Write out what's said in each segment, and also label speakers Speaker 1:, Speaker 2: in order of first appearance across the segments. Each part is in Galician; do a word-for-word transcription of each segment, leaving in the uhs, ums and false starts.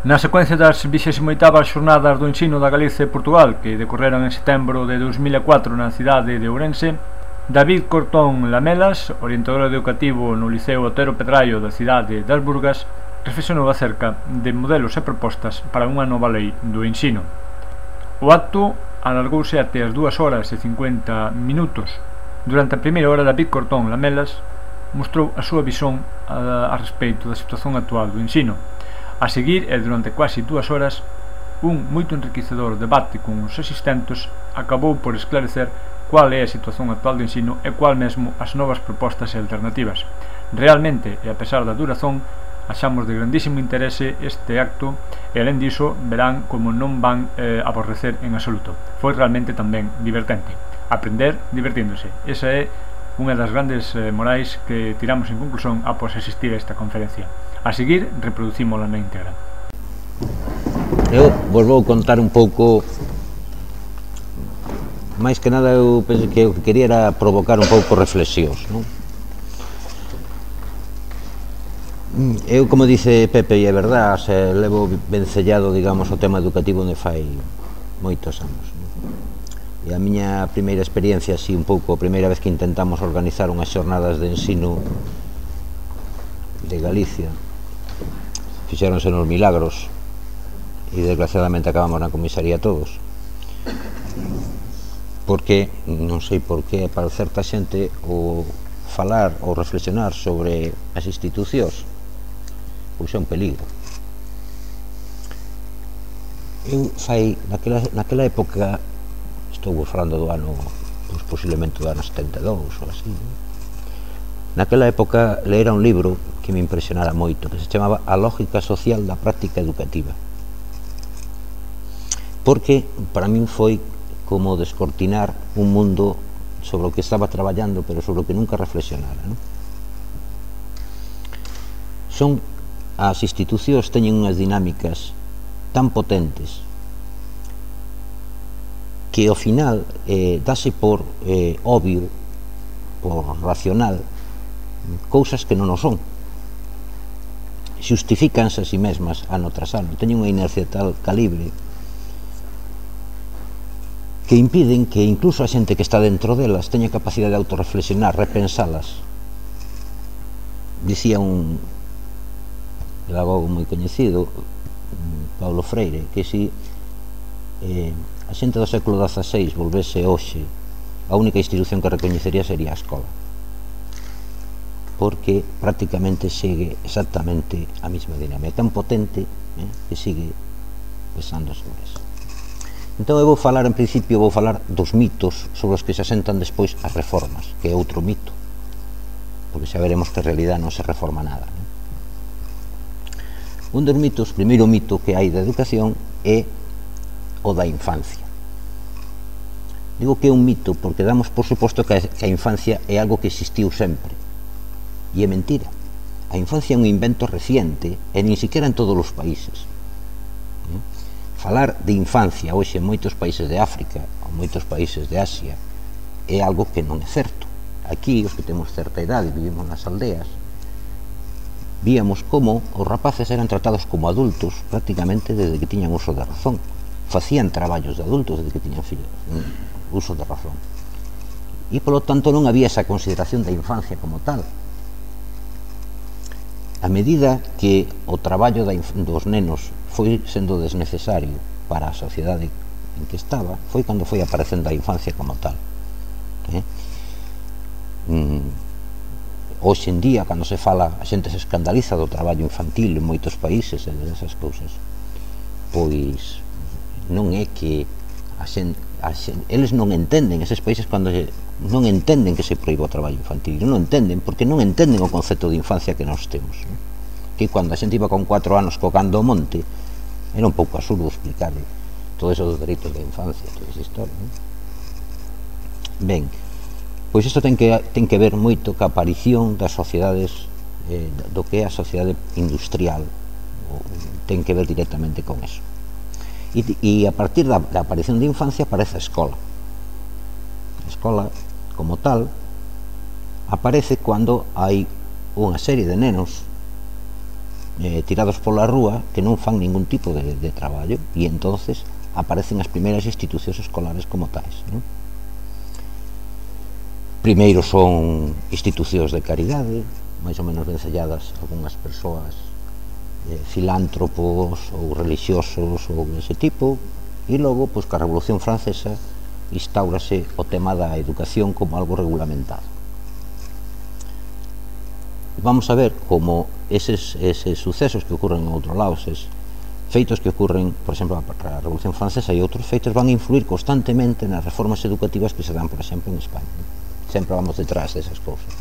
Speaker 1: Na secuencia das vixésimo oitavas xornadas do ensino da Galicia e Portugal, que decorreron en setembro de dous mil e catro na cidade de Ourense, David Cortón Lamelas, orientador educativo no Liceo Otero Pedraio da cidade das Burgas, reflexionou acerca de modelos e propostas para unha nova lei do ensino. O acto alargouse até as dúas horas e cincuenta minutos. Durante a primeira hora, David Cortón Lamelas mostrou a súa visón a, a respeito da situación actual do ensino. A seguir, e durante quasi dúas horas, un moito enriquecedor debate con os asistentes acabou por esclarecer cual é a situación actual do ensino e cual mesmo as novas propostas e alternativas. Realmente, e a pesar da durazón, achamos de grandísimo interese este acto e, alén diso, verán como non van eh, aborrecer en absoluto. Foi realmente tamén divertente. Aprender divertíndose. Esa é unha das grandes eh, morais que tiramos en conclusión após asistir a esta conferencia. A seguir, reproducímola na íntegra.
Speaker 2: Eu vos vou contar un pouco. Mais que nada, eu penso que o que quería era provocar un pouco reflexións, non? Eu, como dice Pepe, e é verdad, se levo vencellado, digamos, o tema educativo onde fai moitos anos, non? E a miña primeira experiencia, así un pouco, a primeira vez que intentamos organizar unhas xornadas de ensino de Galicia, fixéronse nos Milagros e desgraciadamente acabamos na comisaría todos, porque, non sei por que, para certa xente o falar ou reflexionar sobre as institucións pois é un peligro. Eu fai, naquela, naquela época, estou falando do ano, pois posiblemente do ano setenta e dous ou así, naquela época leera un libro que me impresionara moito, que se chamaba A lógica social da práctica educativa, porque para min foi como descortinar un mundo sobre o que estaba traballando, pero sobre o que nunca reflexionara, non? Son as institucións teñen unhas dinámicas tan potentes que ao final eh, dase por eh, obvio, por racional, cousas que non o son. Xustifícanse a si mesmas ano tras ano, teñen unha inercia tal calibre que impiden que incluso a xente que está dentro delas teña capacidade de autorreflexionar, repensalas. Dicía un pedagogo moi coñecido, Paulo Freire, que si eh, a xente do século dezaseis volvese hoxe, a única institución que recoñecería sería a escola, porque prácticamente segue exactamente a mesma dinámica, tan potente eh, que sigue pesando sobre eso. Entón eu vou falar, en principio, vou falar dos mitos sobre os que se asentan despois as reformas, que é outro mito, porque xa veremos que en realidad non se reforma nada, non? Un dos mitos, o primeiro mito que hai da educación é o da infancia. Digo que é un mito porque damos por suposto que a infancia é algo que existiu sempre, e é mentira. A infancia é un invento reciente e nin siquiera en todos os países. Falar de infancia hoxe en moitos países de África ou moitos países de Asia é algo que non é certo. Aquí, os que temos certa idade e vivimos nas aldeas, víamos como os rapaces eran tratados como adultos prácticamente desde que tiñan uso de razón. Facían traballos de adultos desde que tiñan uso de razón. E, polo tanto, non había esa consideración da infancia como tal. A medida que o traballo dos nenos foi sendo desnecesario para a sociedade en que estaba, foi cando foi aparecendo a infancia como tal. Eh? Mm, hoxe en día, cando se fala, a xente se escandaliza do traballo infantil en moitos países e desas cousas, pois non é que a xente, a xente, eles non entenden, eses países cando se, non entenden que se proíba o traballo infantil, non entenden, porque non entenden o concepto de infancia que nós temos, non? Que cando a xente iba con cuatro anos cocando o monte, era un pouco absurdo explicar todo eso dos dereitos da infancia, toda esa historia, non? Ben, pois isto ten que, ten que ver moito ca aparición das sociedades, eh, do que é a sociedade industrial, ten que ver directamente con eso. E, e a partir da, da aparición da infancia aparece a escola. A escola, como tal, aparece cando hai unha serie de nenos eh, tirados pola rúa que non fan ningún tipo de, de traballo, e entonces aparecen as primeiras institucións escolares como tais, non? Primeiro son institucións de caridade, máis ou menos vencelladas algunhas persoas, eh, filántropos ou religiosos ou dese tipo, e logo, pois, ca Revolución Francesa instaurase o tema da educación como algo regulamentado. Vamos a ver como eses, eses sucesos que ocurren en outro lado, eses feitos que ocurren, por exemplo, para a Revolución Francesa e outros feitos van a influir constantemente nas reformas educativas que se dan, por exemplo, en España. Sempre vamos detrás desas cousas.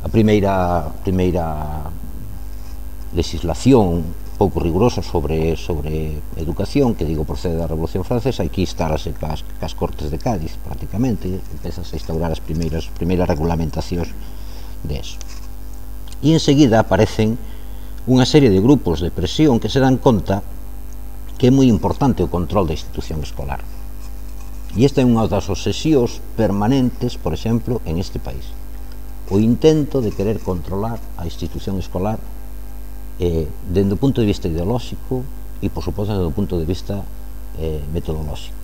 Speaker 2: A primeira, primeira legislación pouco rigurosa sobre, sobre educación, que digo procede da Revolución Francesa, aquí estarase cas, cas Cortes de Cádiz, prácticamente, empezas a instaurar as primeiras, primeiras regulamentacións de eso. E enseguida aparecen unha serie de grupos de presión que se dan conta que é moi importante o control da institución escolar. E esta é unha das obsesións permanentes, por exemplo, en este país. O intento de querer controlar a institución escolar eh, dende o punto de vista ideolóxico e, por suposto, dende o punto de vista eh, metodolóxico.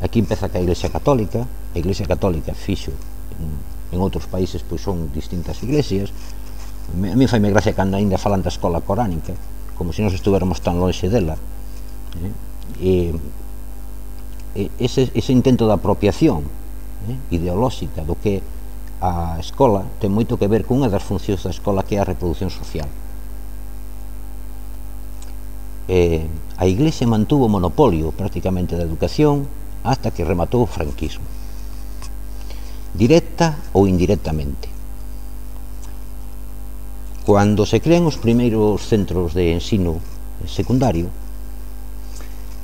Speaker 2: Aquí empeza que a Iglesia Católica, a Iglesia Católica fixo en, en outros países, pois son distintas iglesias. A mí faime gracia cando ainda falan da escola coránica, como se nos estuvermos tan longe dela. Eh? E, ese, ese intento de apropiación eh, ideolóxica do que a escola ten moito que ver con unha das funcións da escola, que é a reproducción social. Eh, a Iglesia mantuvo o monopolio prácticamente da educación hasta que rematou o franquismo, directa ou indirectamente. Cando se crean os primeiros centros de ensino secundario,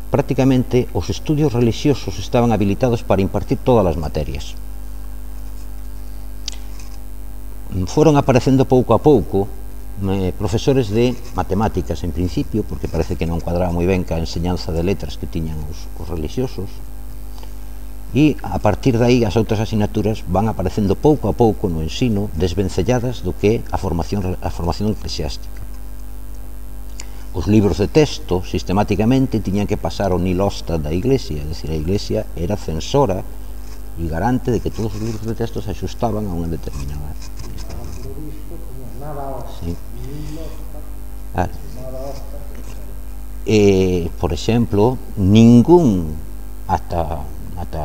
Speaker 2: prácticamente os estudios religiosos estaban habilitados para impartir todas as materias. Foron aparecendo pouco a pouco eh, profesores de matemáticas en principio, porque parece que non cuadraba moi ben ca enseñanza de letras que tiñan os, os religiosos, e a partir de aí as outras asignaturas van aparecendo pouco a pouco no ensino, desvencelladas do que a formación, a formación eclesiástica. Os libros de texto sistemáticamente tiñan que pasar ao nilosta da Iglesia, é dicir, a Iglesia era censora e garante de que todos os libros de texto se axustaban a unha determinada. Sí. Ah. Eh, por exemplo, ningún, hasta, hasta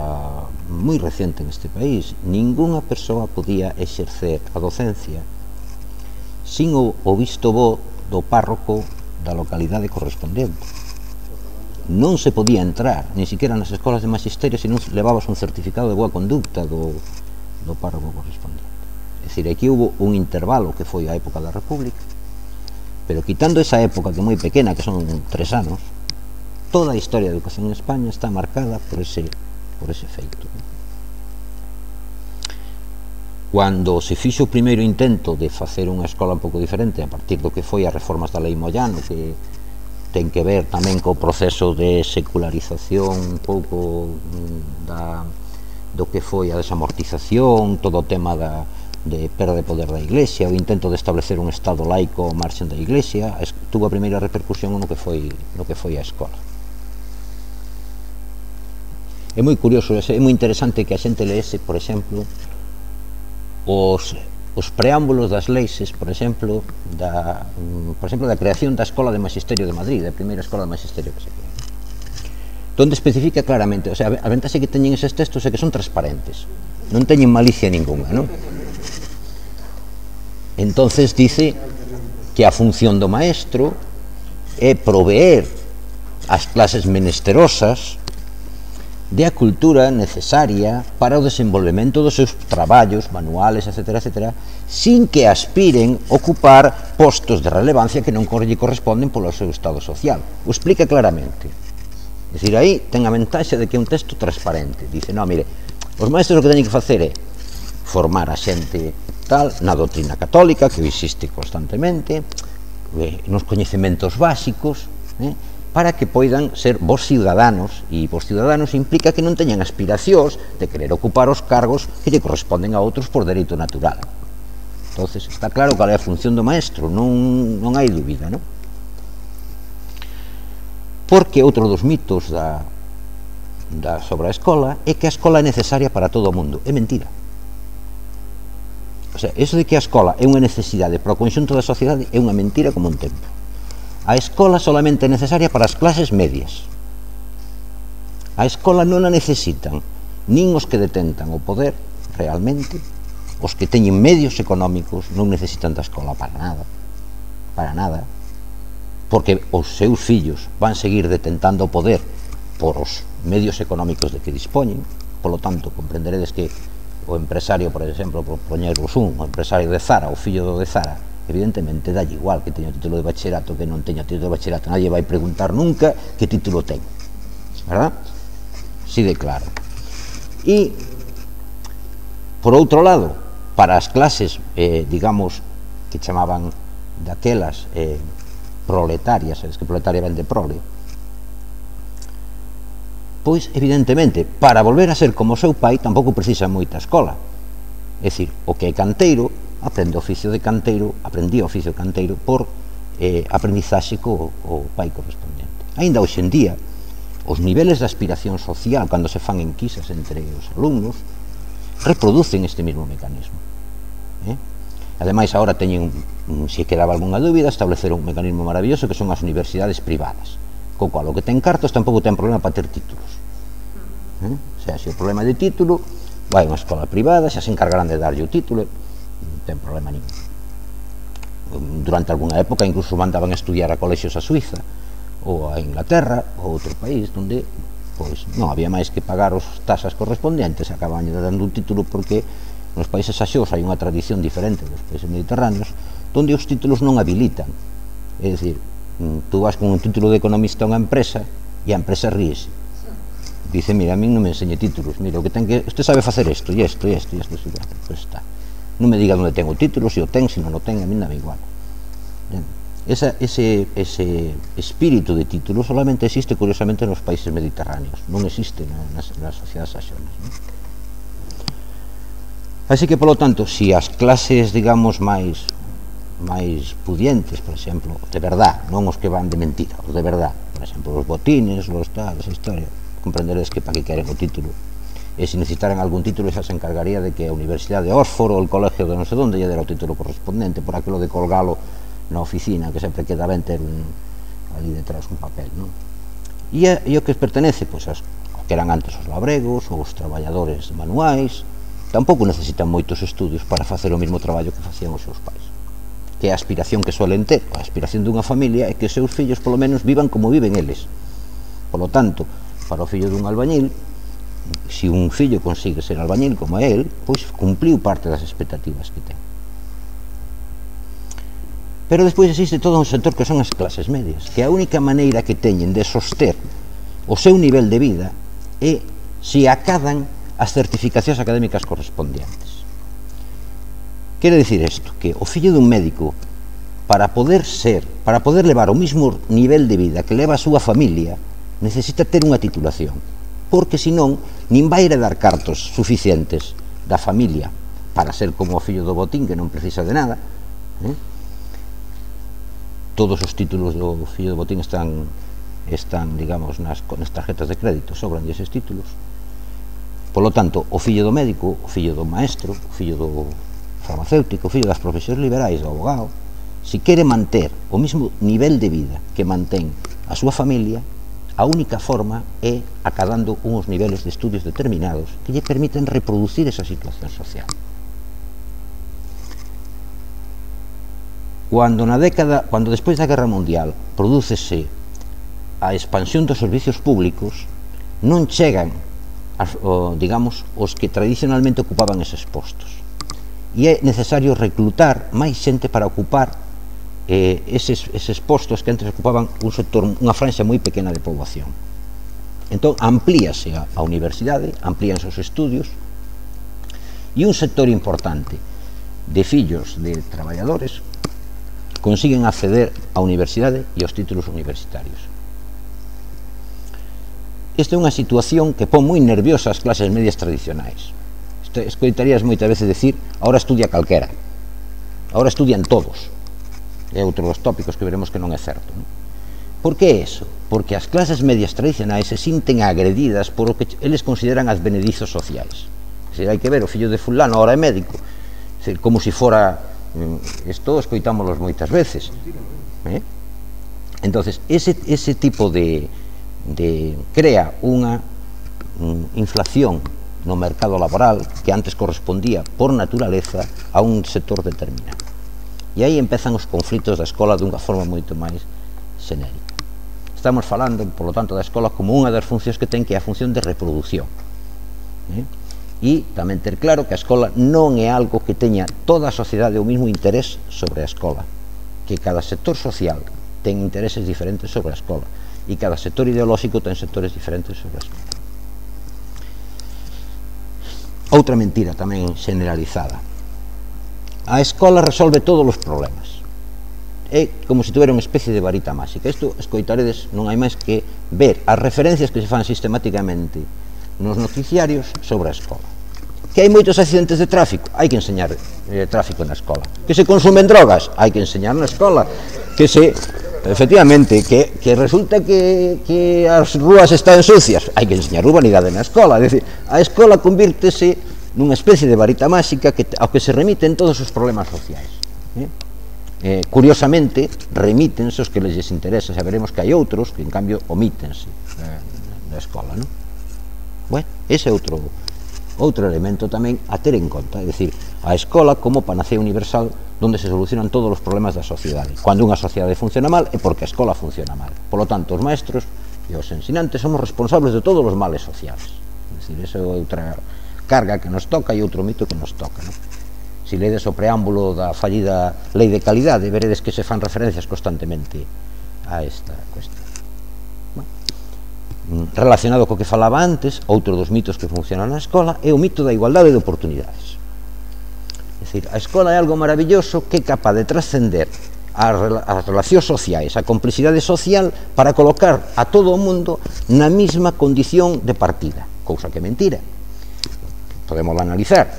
Speaker 2: moi recente en este país, ningunha persoa podía exercer a docencia sin o, o visto bo do párroco da localidade correspondente. Non se podía entrar, ni siquiera nas escolas de magisterio, se non levabas un certificado de boa conducta do, do párroco correspondente. É dicir, aquí hubo un intervalo que foi a época da República, pero quitando esa época que é moi pequena, que son tres anos, toda a historia da educación en España está marcada por ese, por ese feito. Cando se fixo o primeiro intento de facer unha escola un pouco diferente a partir do que foi as reformas da Lei Moyano, que ten que ver tamén co proceso de secularización un pouco da, do que foi a desamortización, todo o tema da de perda de poder da Iglesia, o intento de establecer un Estado laico ao marxen da Iglesia, tuvo a primeira repercusión no que foi, no que foi a escola. É moi curioso, é moi interesante que a xente leese, por exemplo, os, os preámbulos das leixes, por exemplo, da, por exemplo, da creación da Escola de Magisterio de Madrid, da primeira Escola de Magisterio que se crea, donde especifica claramente, o sea, a ventaxe que teñen eses textos é que son transparentes, non teñen malicia ninguna, non? Entonces dice que a función do maestro é proveer as clases menesterosas de a cultura necesaria para o desenvolvemento dos seus traballos, manuales, etcétera, etcétera, sin que aspiren a ocupar postos de relevancia que non lle corresponden polo seu estado social. O explica claramente. É dicir, aí ten a ventaxe de que é un texto transparente. Dice, non, mire, os maestros o que teñen que facer é formar a xente tal, na doutrina católica, que existe constantemente, eh, nos coñecementos básicos, eh, para que poidan ser vos ciudadanos, e vos ciudadanos implica que non teñan aspiracións de querer ocupar os cargos que lle corresponden a outros por dereito natural. Entonces está claro cal é a función do maestro, non, non hai dúbida, non? Porque outro dos mitos da, da sobre a escola é que a escola é necesaria para todo o mundo. É mentira. O sea, eso de que a escola é unha necesidade para o conxunto da sociedade é unha mentira como un templo. A escola solamente é necesaria para as clases medias. A escola non a necesitan nin os que detentan o poder realmente. Os que teñen medios económicos non necesitan da escola para nada, para nada, porque os seus fillos van seguir detentando o poder por os medios económicos de que dispoñen. Polo tanto, comprenderedes que o empresario, por exemplo, por poñervos un, o empresario de Zara, o fillo do de Zara, evidentemente dalle igual que teña o título de bachillerato que non teña título de bachillerato, nadie vai preguntar nunca que título ten, verdad? Si de claro. E por outro lado, para as clases, eh, digamos, que chamaban daquelas eh, proletarias, sabes que proletaria ven de prole, pois, evidentemente, para volver a ser como o seu pai, tampouco precisa moita escola. É dicir, o que é canteiro, aprende o oficio de canteiro, aprendía o oficio de canteiro por eh, aprendizaxe co o pai correspondente. Ainda hoxe en día, os niveles de aspiración social, cando se fan enquisas entre os alumnos, reproducen este mismo mecanismo. Eh? Ademais, agora teñen, se quedaba algunha dúbida, establecer un mecanismo maravilloso que son as universidades privadas, co cual o que ten cartos tampouco ten problema para ter títulos. Eh? O sea, se o problema de título, vai a unha escola privada, xa se encargarán de darlle o título, non ten problema ningún. Durante algunha época incluso mandaban a estudiar a colexios a Suiza ou a Inglaterra ou outro país onde pois non había máis que pagar os tasas correspondentes, acaban dando un título porque nos países axós hai unha tradición diferente dos países mediterráneos onde os títulos non habilitan. É dicir, tú vas con un título de economista a unha empresa e a empresa ríese. Dice, mira, a mí non me enseñe títulos, mira, o que ten que, usted sabe facer isto, e isto, e isto, e isto, pues está. Non me diga onde ten o título, se o ten, se non o ten, a mí dame igual. Esa, ese, ese espírito de título solamente existe curiosamente nos países mediterráneos, non existe nas, nas sociedades axonas, non? Así que, polo tanto, se as clases, digamos, máis máis pudientes, por exemplo, de verdad, non os que van de mentira, os de verdad, por exemplo, os botines, os tal, esa historia, comprenderedes que para que queren o título, e se necesitaran algún título xa se encargaría de que a Universidade de Oxford ou o colegio de non sei onde lle dera o título correspondente, por aquilo de colgalo na oficina, que sempre queda ben ter un, ali detrás un papel, non? E, a, e o que pertenece, pois, as, que eran antes os labregos, ou os traballadores manuais, tampouco necesitan moitos estudios para facer o mesmo traballo que facían os seus pais. Que a aspiración que suelen ter, a aspiración dunha familia, é que os seus fillos, polo menos, vivan como viven eles. Polo tanto, para o fillo dun albañil, se un fillo consigue ser albañil como é el, pois cumpliu parte das expectativas que ten. Pero despois existe todo un sector que son as clases medias, que a única maneira que teñen de soster o seu nivel de vida é se acadan as certificacións académicas correspondentes. Quere dicir isto, que o fillo dun médico, para poder ser, para poder levar o mismo nivel de vida que leva a súa familia, necesita ter unha titulación, porque senón nin vai heredar cartos suficientes da familia para ser como o fillo do botín, que non precisa de nada, eh? Todos os títulos do fillo do botín están, están digamos, nas, nas tarjetas de crédito, sobran eses títulos. Polo tanto, o fillo do médico, o fillo do maestro, o fillo do farmacéutico, o fillo das profesións liberais, do abogado, se quere manter o mesmo nivel de vida que mantén a súa familia, a única forma é acadando uns niveles de estudios determinados que lle permiten reproducir esa situación social. Cuando na década, cuando despois da Guerra Mundial prodúcese a expansión dos servicios públicos, non chegan, as, o, digamos, os que tradicionalmente ocupaban eses postos. E é necesario reclutar máis xente para ocupar eh, eses, eses postos que antes ocupaban un sector, unha franxa moi pequena de poboación. Entón, amplíase a, a universidade, amplíanse os estudios, e un sector importante de fillos de traballadores consiguen acceder á universidade e aos títulos universitarios. Esta é unha situación que pon moi nerviosa as clases medias tradicionais. Escoitarías moitas veces decir, ahora estudia calquera. Agora estudian todos. É outro dos tópicos que veremos que non é certo, non? Por que iso? Porque as clases medias tradicionais se sinten agredidas por o que eles consideran as benedizos sociais. Se hai que ver, o fillo de fulano ahora é médico, como se fora, isto escoitámoslos moitas veces, eh? Entonces, ese, ese tipo de, de crea unha um, inflación no mercado laboral que antes correspondía por naturaleza a un sector determinado. E aí empezan os conflitos da escola dunha forma moito máis xenérica. Estamos falando, por lo tanto, da escola como unha das funcións que ten, que é a función de reproducción. Eh? E tamén ter claro que a escola non é algo que teña toda a sociedade o mismo interés sobre a escola, que cada sector social ten intereses diferentes sobre a escola e cada sector ideolóxico ten sectores diferentes sobre a escola. Outra mentira tamén generalizada: a escola resolve todos os problemas, é como se tuvera unha especie de varita máxica. Isto escoitaredes, non hai máis que ver as referencias que se fan sistemáticamente nos noticiarios sobre a escola. Que hai moitos accidentes de tráfico, hai que enseñar eh, tráfico na escola. Que se consumen drogas, hai que enseñar na escola. Que se, efectivamente, que, que resulta que, que as rúas están sucias, hai que enseñar urbanidade na escola. É dicir, a escola convírtese nunha especie de varita máxica que, ao que se remiten todos os problemas sociais. Eh? Eh, curiosamente, remítense os que les interesa. Xa veremos que hai outros que, en cambio, omítense eh, da escola, non? Bueno, ese é outro, outro elemento tamén a ter en conta. É dicir, a escola como panacea universal donde se solucionan todos os problemas da sociedade. Cando unha sociedade funciona mal é porque a escola funciona mal. Por lo tanto, os maestros e os ensinantes somos responsables de todos os males sociais. É dicir, esa é outra carga que nos toca e outro mito que nos toca, non? Se ledes o preámbulo da fallida lei de calidade, veredes que se fan referencias constantemente a esta cuestión. Bueno, relacionado co que falaba antes, outro dos mitos que funcionan na escola é o mito da igualdade de oportunidades. É dicir, a escola é algo maravilloso que é capaz de trascender as relacións sociais, a complexidade social, para colocar a todo o mundo na mesma condición de partida, cousa que é mentira. Podemos analizar,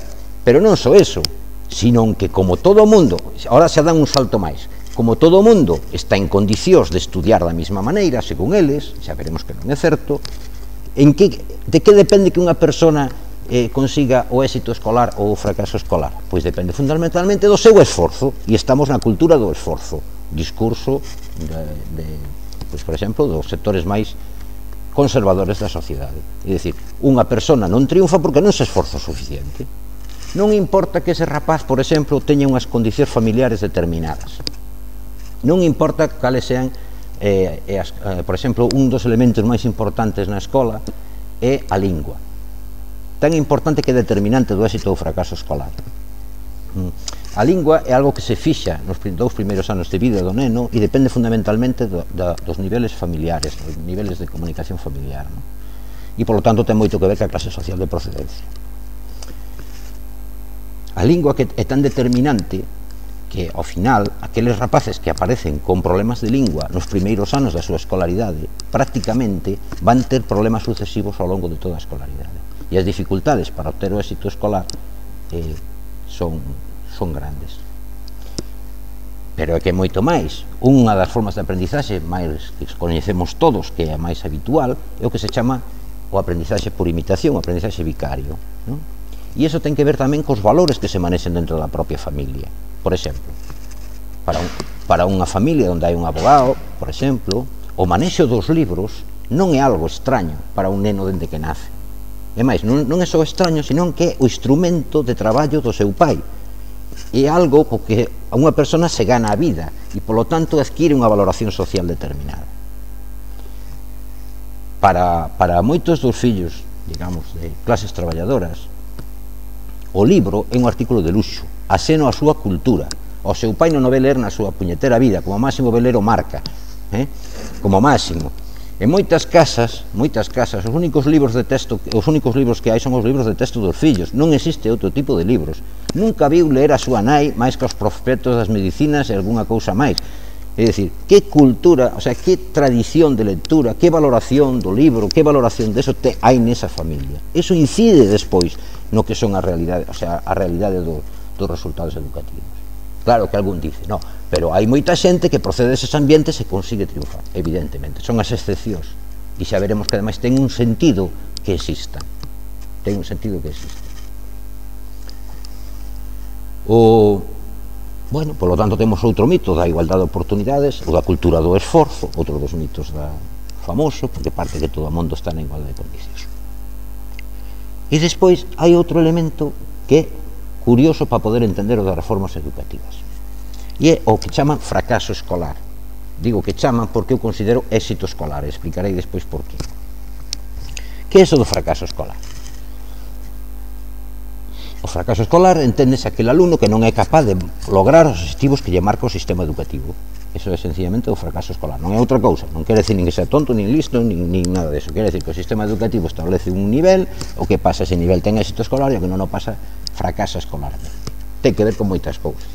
Speaker 2: pero non só eso, sino que como todo o mundo, ahora se dan un salto máis, como todo o mundo está en condicións de estudiar da mesma maneira, según eles, xa veremos que non é certo, en que, de que depende que unha persona eh, consiga o éxito escolar ou o fracaso escolar? Pois depende fundamentalmente do seu esforzo, e estamos na cultura do esforzo, discurso de, de pois, por exemplo, dos sectores máis conservadores da sociedade. É dicir, unha persona non triunfa porque non se esforza o suficiente. Non importa que ese rapaz, por exemplo, teña unhas condicións familiares determinadas. Non importa cales sean, eh, eh, as, eh, por exemplo, un dos elementos máis importantes na escola é a lingua. Tan importante que é determinante do éxito ou fracaso escolar. A lingua é algo que se fixa nos dous primeiros anos de vida do neno e depende fundamentalmente do, da, dos niveles familiares, dos niveles de comunicación familiar, non? E, polo tanto, ten moito que ver ca clase social de procedencia. A lingua que é tan determinante que, ao final, aqueles rapaces que aparecen con problemas de lingua nos primeiros anos da súa escolaridade prácticamente van ter problemas sucesivos ao longo de toda a escolaridade. E as dificultades para obter o éxito escolar eh, son, son grandes. Pero é que moito máis. Unha das formas de aprendizaxe máis que coñecemos todos, que é a máis habitual, é o que se chama o aprendizaxe por imitación, o aprendizaxe vicario, non? E iso ten que ver tamén cos valores que se manexen dentro da propia familia. Por exemplo, para, un, para unha familia onde hai un abogado, por exemplo, o manexo dos libros non é algo extraño para un neno dende que nace. E máis, non, non é só extraño, senón que é o instrumento de traballo do seu pai. É algo co que a unha persona se gana a vida e, polo tanto, adquire unha valoración social determinada. Para, para moitos dos fillos, digamos, de clases traballadoras, o libro é un artículo de luxo, aseno a súa cultura. O seu pai non o ve ler na súa puñetera vida, como máximo ve ler o Marca, eh? como máximo. En moitas casas, moitas casas, os únicos libros de texto, os únicos libros que hai son os libros de texto dos fillos. Non existe outro tipo de libros. Nunca viu ler a súa nai máis que os prospectos das medicinas e algunha cousa máis. É dicir, que cultura, o sea, que tradición de lectura, que valoración do libro, que valoración de eso te hai nesa familia. Eso incide despois no que son a realidade, o sea, a realidade do, dos resultados educativos. Claro que algún dice, no, pero hai moita xente que procede deses ambientes e consigue triunfar, evidentemente, son as excepcións, e xa veremos que ademais ten un sentido que existan, ten un sentido que exista. O, bueno, polo tanto temos outro mito da igualdade de oportunidades, ou da cultura do esforzo, outro dos mitos da famoso, porque parte que todo o mundo está na igualdade de condicións. E despois hai outro elemento que é curioso para poder entender o das reformas educativas, e é o que chaman fracaso escolar. Digo que chaman porque eu considero éxito escolar, e explicarei despois por qué. Que é iso do fracaso escolar? O fracaso escolar enténdese aquele alumno que non é capaz de lograr os obxectivos que lle marca o sistema educativo. Eso é sencillamente o fracaso escolar, non é outra cousa, non quere decir nin que sea tonto, nin listo, nin, nin nada deso, quere decir que o sistema educativo establece un nivel, o que pasa ese nivel ten éxito escolar e o que non o pasa fracasa escolarmente. Ten que ver con moitas cousas.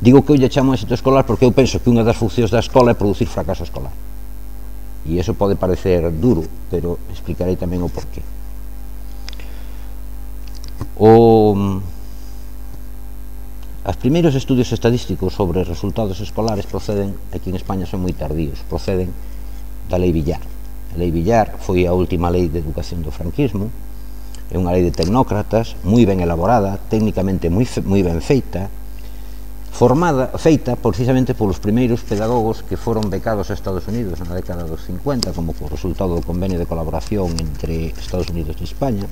Speaker 2: Digo que eu lle chamo éxito escolar porque eu penso que unha das funcións da escola é producir fracaso escolar, e iso pode parecer duro, pero explicarei tamén o porqué. O... Os primeiros estudios estadísticos sobre resultados escolares proceden, aquí en España son moi tardíos, proceden da Lei Villar. A Lei Villar foi a última lei de educación do franquismo, é unha lei de tecnócratas, moi ben elaborada, técnicamente moi, moi ben feita, formada, feita precisamente polos primeiros pedagogos que foron becados a Estados Unidos na década dos cincuenta, como por resultado do convenio de colaboración entre Estados Unidos e España,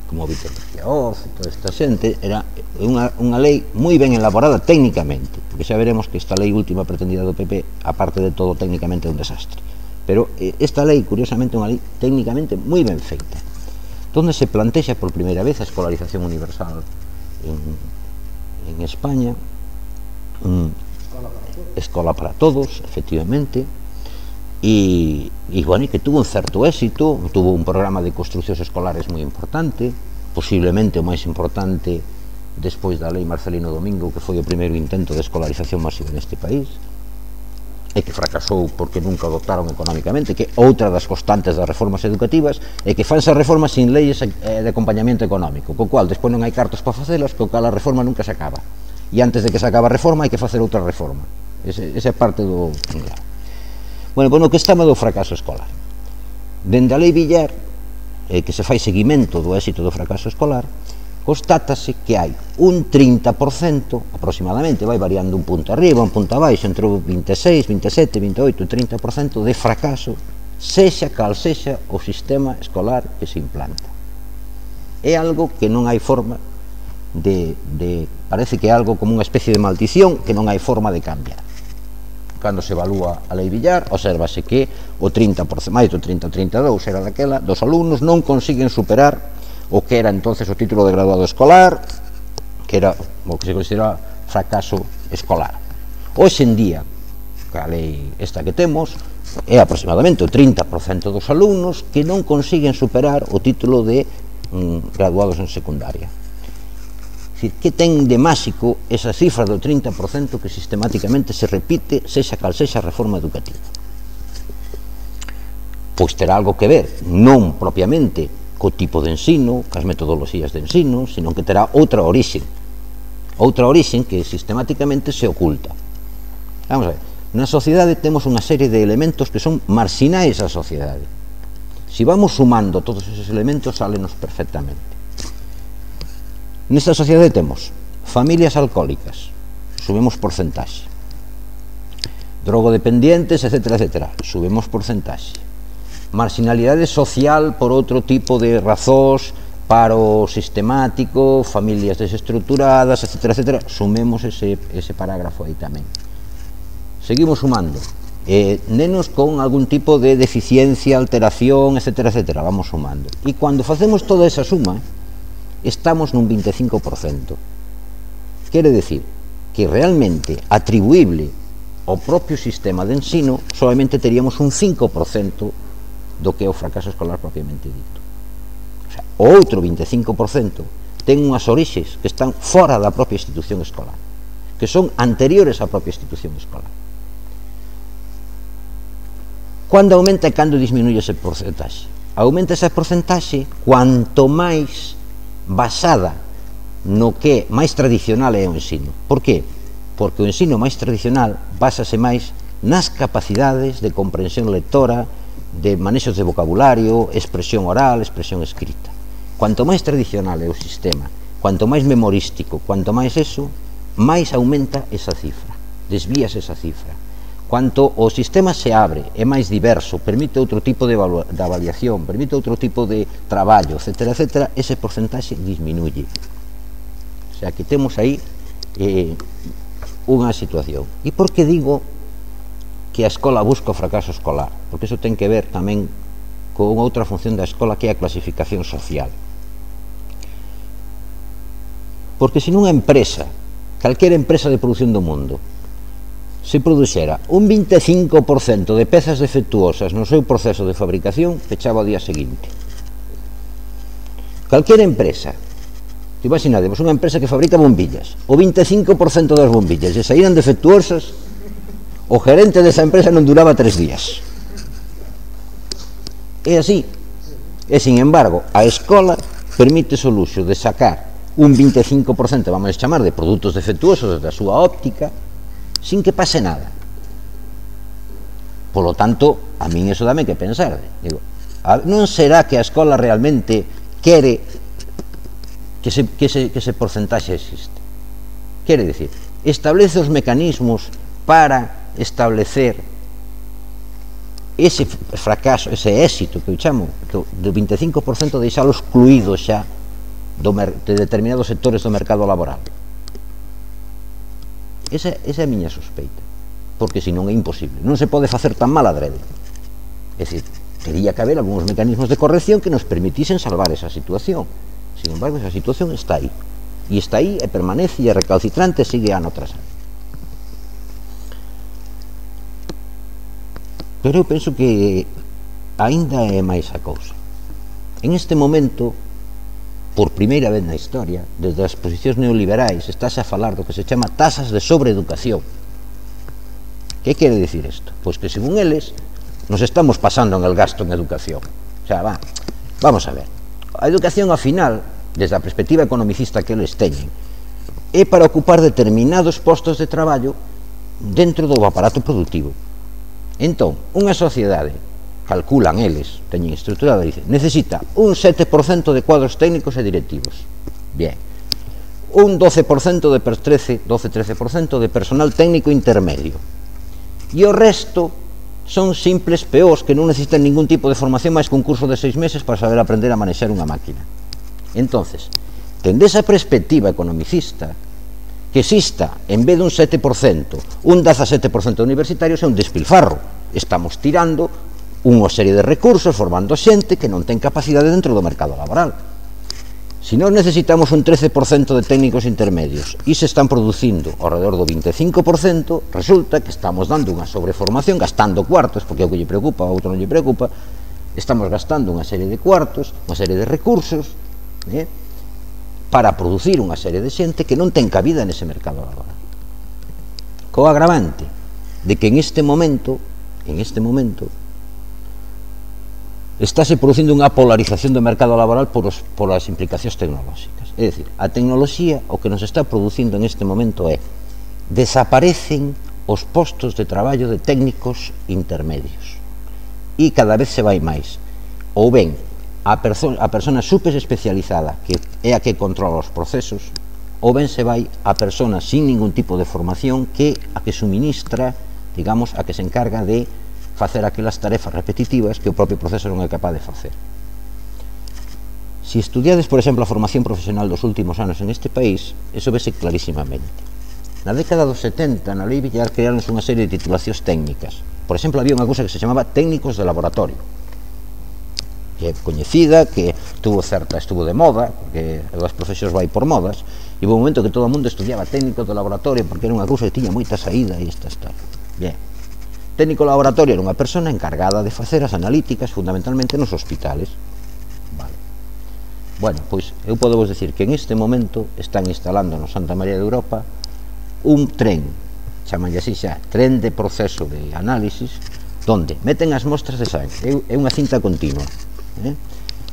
Speaker 2: como Víctor García Oz e toda esta xente. Era unha, unha lei moi ben elaborada técnicamente, porque xa veremos que esta lei última pretendida do P P, aparte de todo, técnicamente é un desastre, pero esta lei, curiosamente, é unha lei técnicamente moi ben feita, donde se plantexa por primeira vez a escolarización universal en, en España, um, escola para todos, efectivamente, e, e, bueno, que tuvo un certo éxito, tuvo un programa de construcións escolares moi importante, posiblemente o máis importante despois da lei Marcelino Domingo, que foi o primeiro intento de escolarización masiva neste país, e que fracasou porque nunca o dotaron económicamente, que outra das constantes das reformas educativas é que fanse reformas sin leyes de acompañamento económico, co cual despois non hai cartos para facelas, co cual a reforma nunca se acaba, e antes de que se acabe a reforma hai que facer outra reforma. Esa é parte do... Bueno, pois no que estamos do fracaso escolar. Dende a Lei Villar, eh, que se fai seguimento do éxito do fracaso escolar, constátase que hai un trinta por cento, aproximadamente, vai variando un punto arriba, un punto abaixo, entre o vinte e seis, vinte e sete, vinte e oito e trinta por cento de fracaso, sexa cal sexa o sistema escolar que se implanta. É algo que non hai forma de, de... parece que é algo como unha especie de maldición que non hai forma de cambiar. Cando se evalúa a Lei Villar, observase que o trinta por cento, máis do trinta, trinta e dous era daquela, dos alumnos non consiguen superar o que era entonces o título de graduado escolar, que era o que se considera fracaso escolar. Hoxe en día, a lei esta que temos, é aproximadamente o trinta por cento dos alumnos que non consiguen superar o título de mm, graduados en secundaria. Que ten de máxico esa cifra do trinta por cento que sistemáticamente se repite, sexa cal sexa a reforma educativa? Pois terá algo que ver, non propiamente co tipo de ensino, cas metodoloxías de ensino, sino que terá outra orixe, outra orixe que sistemáticamente se oculta. Vamos a ver, na sociedade temos unha serie de elementos que son marxinais á sociedade. Se vamos sumando todos esos elementos, sálenos perfectamente. Nesta sociedade temos familias alcohólicas, subimos porcentaxe, drogodependientes, etcétera, etcétera, subimos porcentaxe, marginalidade social por outro tipo de razóns, paro sistemático, familias desestructuradas, etcétera, etcétera, sumemos ese, ese parágrafo aí tamén. Seguimos sumando, eh, nenos con algún tipo de deficiencia, alteración, etcétera, etcétera, vamos sumando. E cando facemos toda esa suma, estamos nun vinte e cinco por cento. Quere decir que realmente atribuible ao propio sistema de ensino solamente teríamos un cinco por cento do que é o fracaso escolar propiamente dito. O sea, o outro vinte e cinco por cento ten unhas orixes que están fora da propia institución escolar, que son anteriores á propia institución escolar. Cando aumenta e cando disminuye ese porcentaxe? Aumenta ese porcentaxe cuanto máis basada no que máis tradicional é o ensino. Por que? Porque o ensino máis tradicional básase máis nas capacidades de comprensión lectora, de manexos de vocabulario, expresión oral, expresión escrita. Cuanto máis tradicional é o sistema, cuanto máis memorístico, cuanto máis eso, máis aumenta esa cifra, desvías esa cifra. Cuanto o sistema se abre, é máis diverso, permite outro tipo de, de avaliación, permite outro tipo de traballo, etcétera, etcétera, ese porcentaxe disminuye. O sea, que temos aí eh, unha situación. E por que digo que a escola busca o fracaso escolar? Porque iso ten que ver tamén con outra función da escola, que é a clasificación social. Porque se nunha empresa, calquera empresa de produción do mundo, se produxera un vinte e cinco por cento de pezas defectuosas no seu proceso de fabricación, fechaba o día seguinte. Calquera empresa, imaginademos unha empresa que fabrica bombillas, o vinte e cinco por cento das bombillas e saíran defectuosas, o gerente desa empresa non duraba tres días. É así. E, sin embargo, a escola permite o luxo de sacar un vinte e cinco por cento, vamos a chamar, de produtos defectuosos da súa óptica, sin que pase nada. Por lo tanto, a min eso dame que pensar. Digo, non será que a escola realmente quere que ese, que ese, que ese porcentaxe existe? Quere dicir, establece os mecanismos para establecer ese fracaso, ese éxito que eu chamo do, do vinte e cinco por cento, deixalo excluído xa do, de determinados sectores do mercado laboral. Esa, esa é a miña sospeita, porque senón é imposible, non se pode facer tan mal adrede. É dicir, teria que haber algúns mecanismos de corrección que nos permitisen salvar esa situación. Sin embargo, esa situación está aí, e está aí e permanece e é recalcitrante e sigue ano tras ano. Pero eu penso que aínda é máis a cousa. En este momento, por primeira vez na historia, desde as posicións neoliberais, estáse a falar do que se chama tasas de sobreeducación. Que quere dicir isto? Pois que, según eles, nos estamos pasando en el gasto en educación. O sea, va, vamos a ver. A educación, ao final, desde a perspectiva economicista que eles teñen, é para ocupar determinados postos de traballo dentro do aparato productivo. Entón, unha sociedade, calculan eles, teñen estruturada, dice, necesita un sete por cento de cuadros técnicos e directivos. Bien. Un doce por cento de trece, doce a trece por cento de personal técnico intermedio. E o resto son simples peós que non necesitan ningún tipo de formación máis que un curso de seis meses para saber aprender a manexar unha máquina. Entonces, tende esa perspectiva economicista, que exista, en vez de un sete por cento, un dezasete por cento de universitarios é un despilfarro. Estamos tirando unha serie de recursos, formando xente que non ten capacidade dentro do mercado laboral. Se nós necesitamos un trece por cento de técnicos intermedios e se están producindo ao redor do vinte e cinco por cento, resulta que estamos dando unha sobreformación, gastando cuartos, porque é o que lle preocupa, a outro non lle preocupa, estamos gastando unha serie de cuartos, unha serie de recursos, eh, para producir unha serie de xente que non ten cabida nese mercado laboral. Co agravante de que en este momento, en este momento, estáse producindo unha polarización do mercado laboral por, os, por as implicacións tecnolóxicas. É dicir, a tecnoloxía o que nos está producindo en este momento é desaparecen os postos de traballo de técnicos intermedios e cada vez se vai máis. Ou ben, a, perso a persona super especializada, que é a que controla os procesos, ou ben se vai a persona sin ningún tipo de formación, que a que suministra, digamos, a que se encarga de facer aquelas tarefas repetitivas que o propio proceso non é capaz de facer. Se estudiades, por exemplo, a formación profesional dos últimos anos en este país, eso vese clarísimamente. Na década dos setenta, na Lei Villar, creáronse unha serie de titulacións técnicas. Por exemplo, había unha cousa que se chamaba técnicos de laboratorio, que é coñecida, que tuvo certa, estuvo de moda, porque as profesións vai por modas, e houve un momento que todo o mundo estudiaba técnicos de laboratorio porque era unha cousa que tiña moita saída e esta historia. Bien. Técnico de laboratorio era unha persona encargada de facer as analíticas fundamentalmente nos hospitales. Vale. Bueno, pois eu podo vos decir que en este momento están instalando no Santa María de Europa un tren, chamanlle así xa, tren de proceso de análisis, donde meten as mostras de sangre, é unha cinta continua, eh?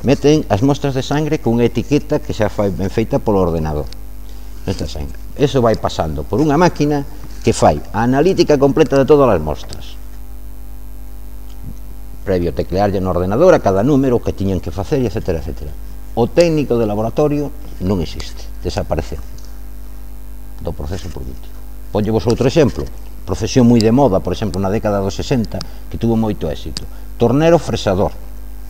Speaker 2: Meten as mostras de sangre con unha etiqueta que xa foi ben feita polo ordenador. Esta sen. Eso vai pasando por unha máquina que fai a analítica completa de todas as mostras, previo teclearlle no ordenador a cada número que tiñan que facer, etcétera, etcétera. O técnico de laboratorio non existe, desapareceu do proceso productivo. Ponllevos outro exemplo, profesión moi de moda, por exemplo, na década dos sesenta, que tuvo moito éxito. Tornero fresador.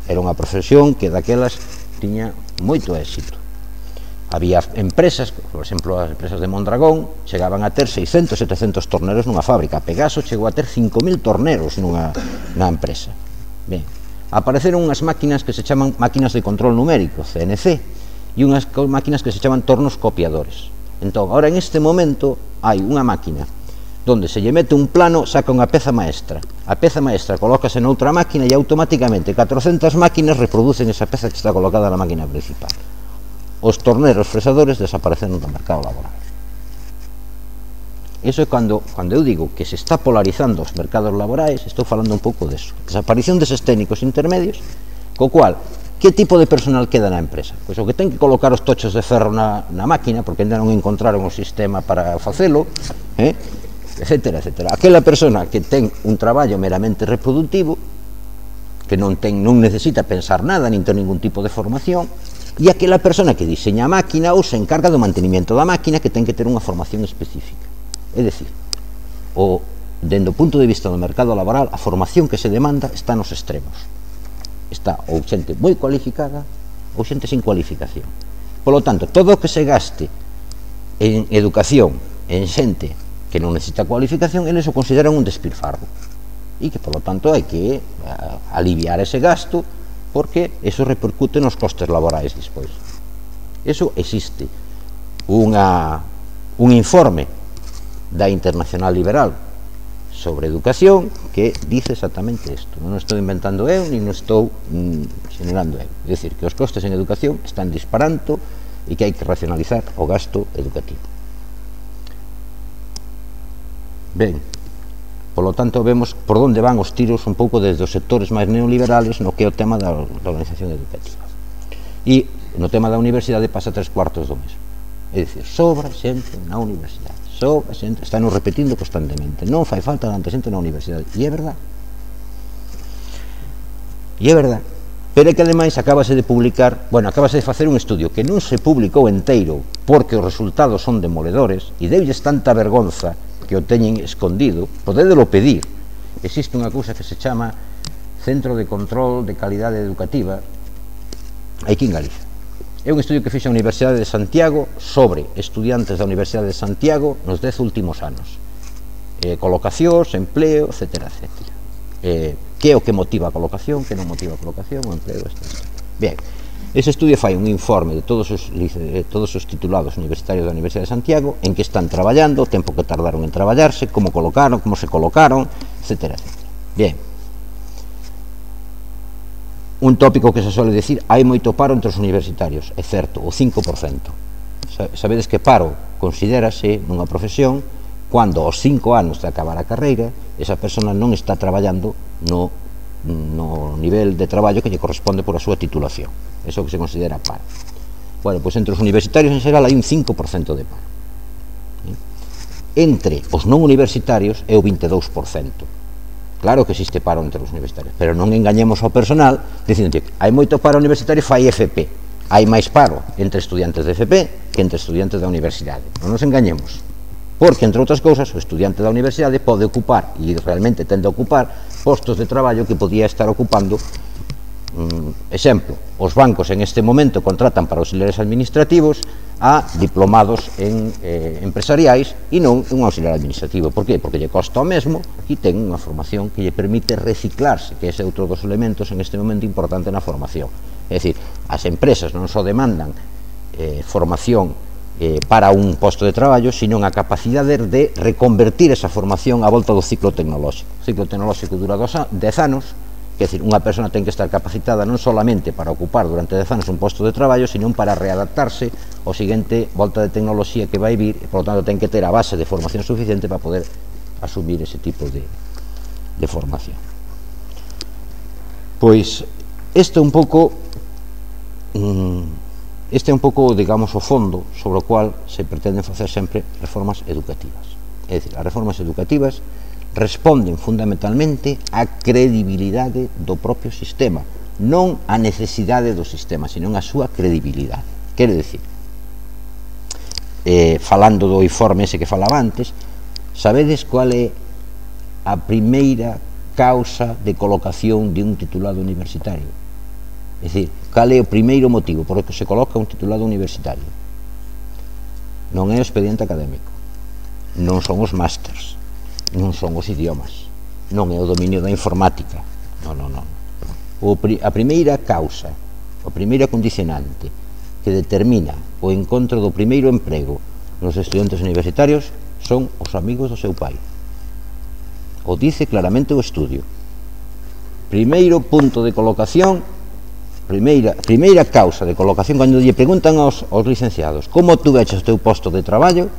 Speaker 2: Era unha profesión que daquelas tiña moito éxito. Había empresas, por exemplo, as empresas de Mondragón, chegaban a ter seiscentos, setecentos torneros nunha fábrica. Pegaso chegou a ter cinco mil torneros nunha, nunha empresa. Ben, apareceron unhas máquinas que se chaman máquinas de control numérico, C N C, e unhas máquinas que se chaman tornos copiadores. Entón, ahora en este momento hai unha máquina donde se lle mete un plano, saca unha peza maestra. A peza maestra colócase noutra máquina e automáticamente catrocentas máquinas reproducen esa peza que está colocada na máquina principal. Os torneros fresadores desapareceron do mercado laboral. Eso é cando, cando eu digo que se está polarizando os mercados laborais, estou falando un pouco deso. Desaparición deses técnicos intermedios, co cual, que tipo de personal queda na empresa? Pois o que ten que colocar os tochos de ferro na, na máquina, porque ainda non encontraron o sistema para facelo, eh? etcétera, etcétera. Aquela persona que ten un traballo meramente reproductivo, que non, ten, non necesita pensar nada, nin ten ningún tipo de formación, e aquela persona que diseña a máquina ou se encarga do mantenimiento da máquina, que ten que ter unha formación específica. É dicir, o, dende o punto de vista do mercado laboral, a formación que se demanda está nos extremos. Está ou xente moi cualificada ou xente sin cualificación. Por lo tanto, todo o que se gaste en educación en xente que non necesita cualificación, eles o consideran un despilfarro. E que, por lo tanto, hai que a, aliviar ese gasto, porque eso repercute nos costes laborais despois. Eso existe. Unha, un informe da Internacional Liberal sobre educación que dice exactamente isto. Non estou inventando eu, ni non estou mm, generando eu. É dicir, que os costes en educación están disparando e que hai que racionalizar o gasto educativo. Ben, polo tanto, vemos por onde van os tiros un pouco desde os sectores máis neoliberales no que é o tema da, da organización educativa. E no tema da universidade pasa tres cuartos do mesmo. É dicir, sobra xente na universidade, sobra xente, están nos repetindo constantemente, non fai falta tanta xente na universidade, e é verdad. E é verdad. Pero é que ademais acabase de publicar, bueno, acabase de facer un estudio que non se publicou enteiro porque os resultados son demoledores e deulles tanta vergonza que o teñen escondido, podédelo pedir. Existe unha cousa que se chama Centro de Control de Calidade Educativa aquí en Galicia. É un estudio que fixa a Universidade de Santiago sobre estudiantes da Universidade de Santiago nos dez últimos anos. Eh, colocacións, empleo, etcétera, etcétera. Eh, que é o que motiva a colocación, que non motiva a colocación, o empleo, etcétera. Bien, ese estudio fai un informe de todos os, de todos os titulados universitarios da Universidade de Santiago, en que están traballando, o tempo que tardaron en traballarse, como colocaron, como se colocaron, etcétera, etcétera. Bien. Un tópico que se suele decir, hai moito paro entre os universitarios, é certo, o cinco por cento. Sabedes que paro considérase nunha profesión cando aos cinco anos de acabar a carreira esa persona non está traballando no, no nivel de traballo que lle corresponde por a súa titulación. Eso que se considera paro. Bueno, pois entre os universitarios en xeral hai un cinco por cento de paro. Entre os non universitarios é o vinte e dous por cento. Claro que existe paro entre os universitarios, pero non engañemos ao personal dicindo que hai moito paro universitario, fai F P. Hai máis paro entre estudiantes de F P que entre estudiantes da universidade. Non nos engañemos. Porque, entre outras cousas, o estudiante da universidade pode ocupar, e realmente tende a ocupar, postos de traballo que podía estar ocupando. Um, exemplo, os bancos en este momento contratan para auxiliares administrativos a diplomados en eh, empresariais e non un auxiliar administrativo. Por qué? Porque lle costa o mesmo e ten unha formación que lle permite reciclarse, que ese é outro dos elementos en este momento importante na formación. É dicir, as empresas non só demandan eh, formación eh, para un posto de traballo, sino a capacidade de reconvertir esa formación á volta do ciclo tecnolóxico. O ciclo tecnolóxico dura dez anos. É dicir, unha persona ten que estar capacitada non solamente para ocupar durante dez anos un posto de traballo, sino para readaptarse ao seguinte volta de tecnoloxía que vai vir, e, por lo tanto, ten que ter a base de formación suficiente para poder asumir ese tipo de, de formación. Pois, isto un pouco mmm, este é un pouco, digamos, o fondo sobre o cual se pretenden facer sempre reformas educativas. É dicir, as reformas educativas responden fundamentalmente á credibilidade do propio sistema, non á necesidade do sistema, sino á súa credibilidade. Quere dicir, eh, falando do informe ese que falaba antes, sabedes cual é a primeira causa de colocación de un titulado universitario? É dicir, cal é o primeiro motivo por que se coloca un titulado universitario? Non é o expediente académico, non son os másters, non son os idiomas, non é o dominio da informática, non, non, non. O, a primeira causa, a primeira condicionante que determina o encontro do primeiro emprego nos estudantes universitarios son os amigos do seu pai. O dice claramente o estudio. Primeiro punto de colocación, primeira, primeira causa de colocación, cando lle preguntan aos, aos licenciados como tú veches o teu posto de traballo,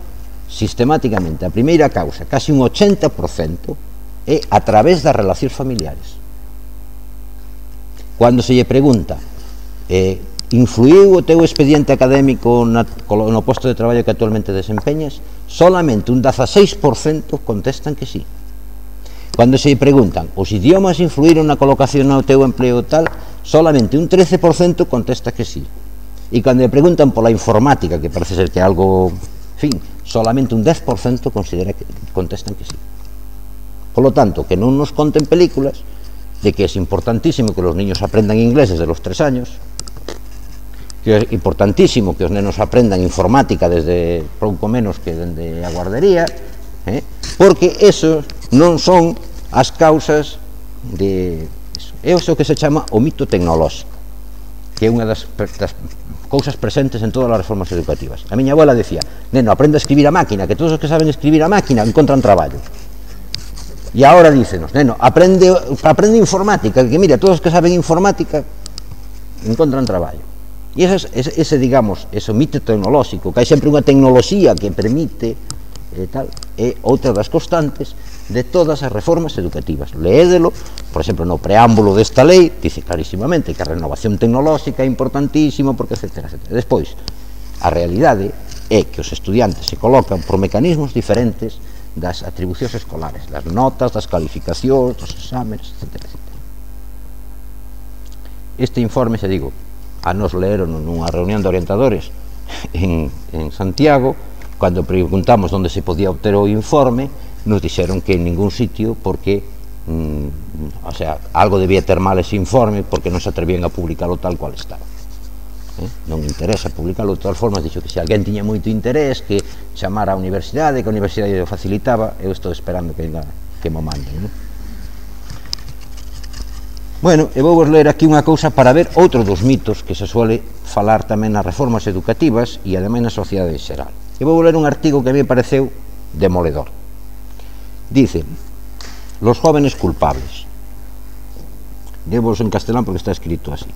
Speaker 2: sistemáticamente a primeira causa, casi un ochenta por cento, é a través das relacións familiares. Cando se lle pregunta eh, influiu o teu expediente académico na, no posto de traballo que actualmente desempeñas, solamente un dieciséis por cento contestan que sí. Cando se lle preguntan os idiomas influíron na colocación no teu empleo tal, solamente un trece por cento contesta que sí. E cando lle preguntan pola informática, que parece ser que é algo, en fin, solamente un dez por cento considera que contestan que sí. Por lo tanto, que non nos conten películas de que é importantísimo que os niños aprendan inglés desde los tres años, que é importantísimo que os nenos aprendan informática desde pouco menos que dende a guardería, eh? porque eso non son as causas de eso. É o que se chama o mito tecnolóxico, que é unha das, das cousas presentes en todas as reformas educativas. A miña abuela decía, neno, aprende a escribir a máquina, que todos os que saben escribir a máquina encontran traballo. E agora dícenos, neno, aprende, aprende informática, que mira, todos os que saben informática encontran traballo. E ese, ese, ese digamos, ese mito tecnolóxico, que hai sempre unha tecnoloxía que permite e tal, é outra das constantes de todas as reformas educativas. Leédelo, por exemplo, no preámbulo desta lei dice clarísimamente que a renovación tecnolóxica é importantísima porque etcétera, etcétera. Despois, a realidade é que os estudiantes se colocan por mecanismos diferentes das atribucións escolares, das notas, das calificacións, dos exámenes, etcétera, etcétera. Este informe, se digo, a nos leeron nunha reunión de orientadores en, en Santiago. Cando preguntamos onde se podía obter o informe, nos dixeron que en ningún sitio, porque mm, o sea, algo debía ter mal ese informe, porque non se atrevían a publicalo tal cual estaba. Eh? Non interesa publicalo. De todas formas, dixo que se alguén tiña moito interés, que chamara a universidade, que a universidade o facilitaba. Eu estou esperando que, que mo manden, non? Bueno, e vou vos ler aquí unha cousa para ver outro dos mitos que se suele falar tamén nas reformas educativas e ademais na sociedade en xeral. E vou ler un artigo que a mí me pareceu demoledor. Dice, los jóvenes culpables. Debos en castelán porque está escrito así.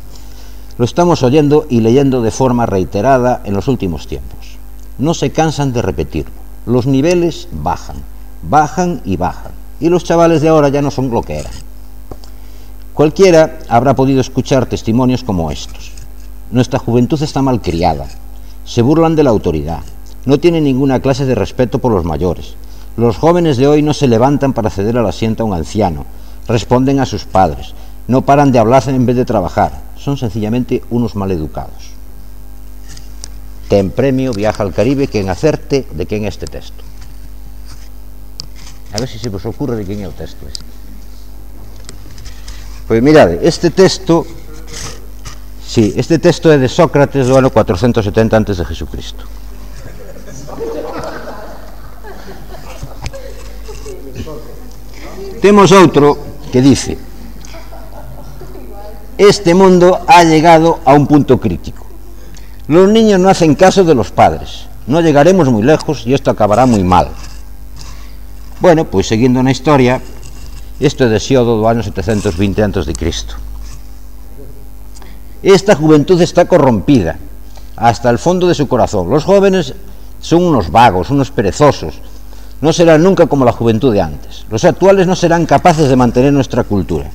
Speaker 2: Lo estamos oyendo y leyendo de forma reiterada en los últimos tiempos. No se cansan de repetirlo. Los niveles bajan, bajan y bajan. Y los chavales de ahora ya no son lo que eran. Cualquiera habrá podido escuchar testimonios como estos. Nuestra juventud está malcriada. Se burlan de la autoridad. No tienen ninguna clase de respeto por los mayores. Los jóvenes de hoy no se levantan para ceder al asiento a un anciano. Responden a sus padres. No paran de hablar en vez de trabajar. Son sencillamente unos maleducados. Ten premio Viaja al Caribe quien acerte de quen é este texto. A ver se se vos ocurre de quen é o texto este. Pois mirade, este texto, sí, este texto é de Sócrates do ano cuatrocentos e setenta antes de Jesucristo. Temos outro que dice: este mundo ha llegado a un punto crítico. Los niños no hacen caso de los padres. No llegaremos muy lejos y esto acabará muy mal. Bueno, pois seguindo na historia, isto é de Hesíodo do ano setecentos vinte antes de Cristo. Esta juventud está corrompida hasta el fondo de su corazón. Los jóvenes son unos vagos, unos perezosos. No serán nunca como la juventud de antes. Los actuales no serán capaces de mantener nuestra cultura.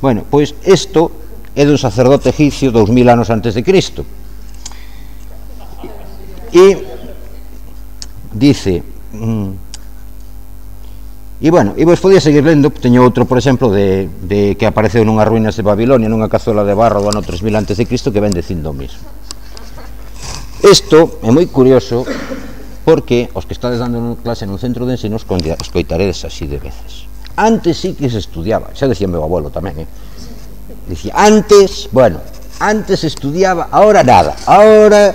Speaker 2: Bueno, pois isto é dun sacerdote egipcio dous mil anos antes de Cristo. e dice mm, e bueno, e vos podía seguir lendo. Teño outro, por exemplo, de, de que apareceu nunhas ruínas de Babilonia, nunha cazuela de barro do ano tres mil antes de Cristo, que ven dicindo o mismo. Isto é moi curioso, porque os que estades dando clase nun centro de ensino os coitaredes así de veces. Antes sí que se estudiaba, xa decía meu abuelo tamén, eh? Dicía, antes, bueno, antes se estudiaba, ahora nada, ahora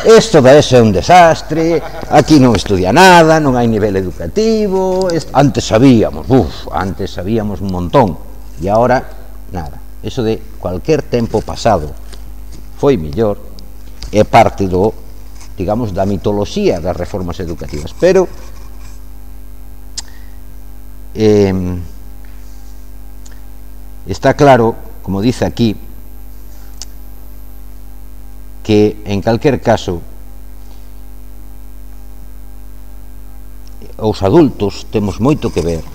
Speaker 2: isto da eso é un desastre, aquí non estudia nada, non hai nivel educativo, antes sabíamos, uf, antes sabíamos un montón, e agora nada. Eso de cualquier tempo pasado foi mellor, é parte do, digamos, da mitoloxía das reformas educativas, pero eh, está claro, como dice aquí, que en calquer caso os adultos temos moito que ver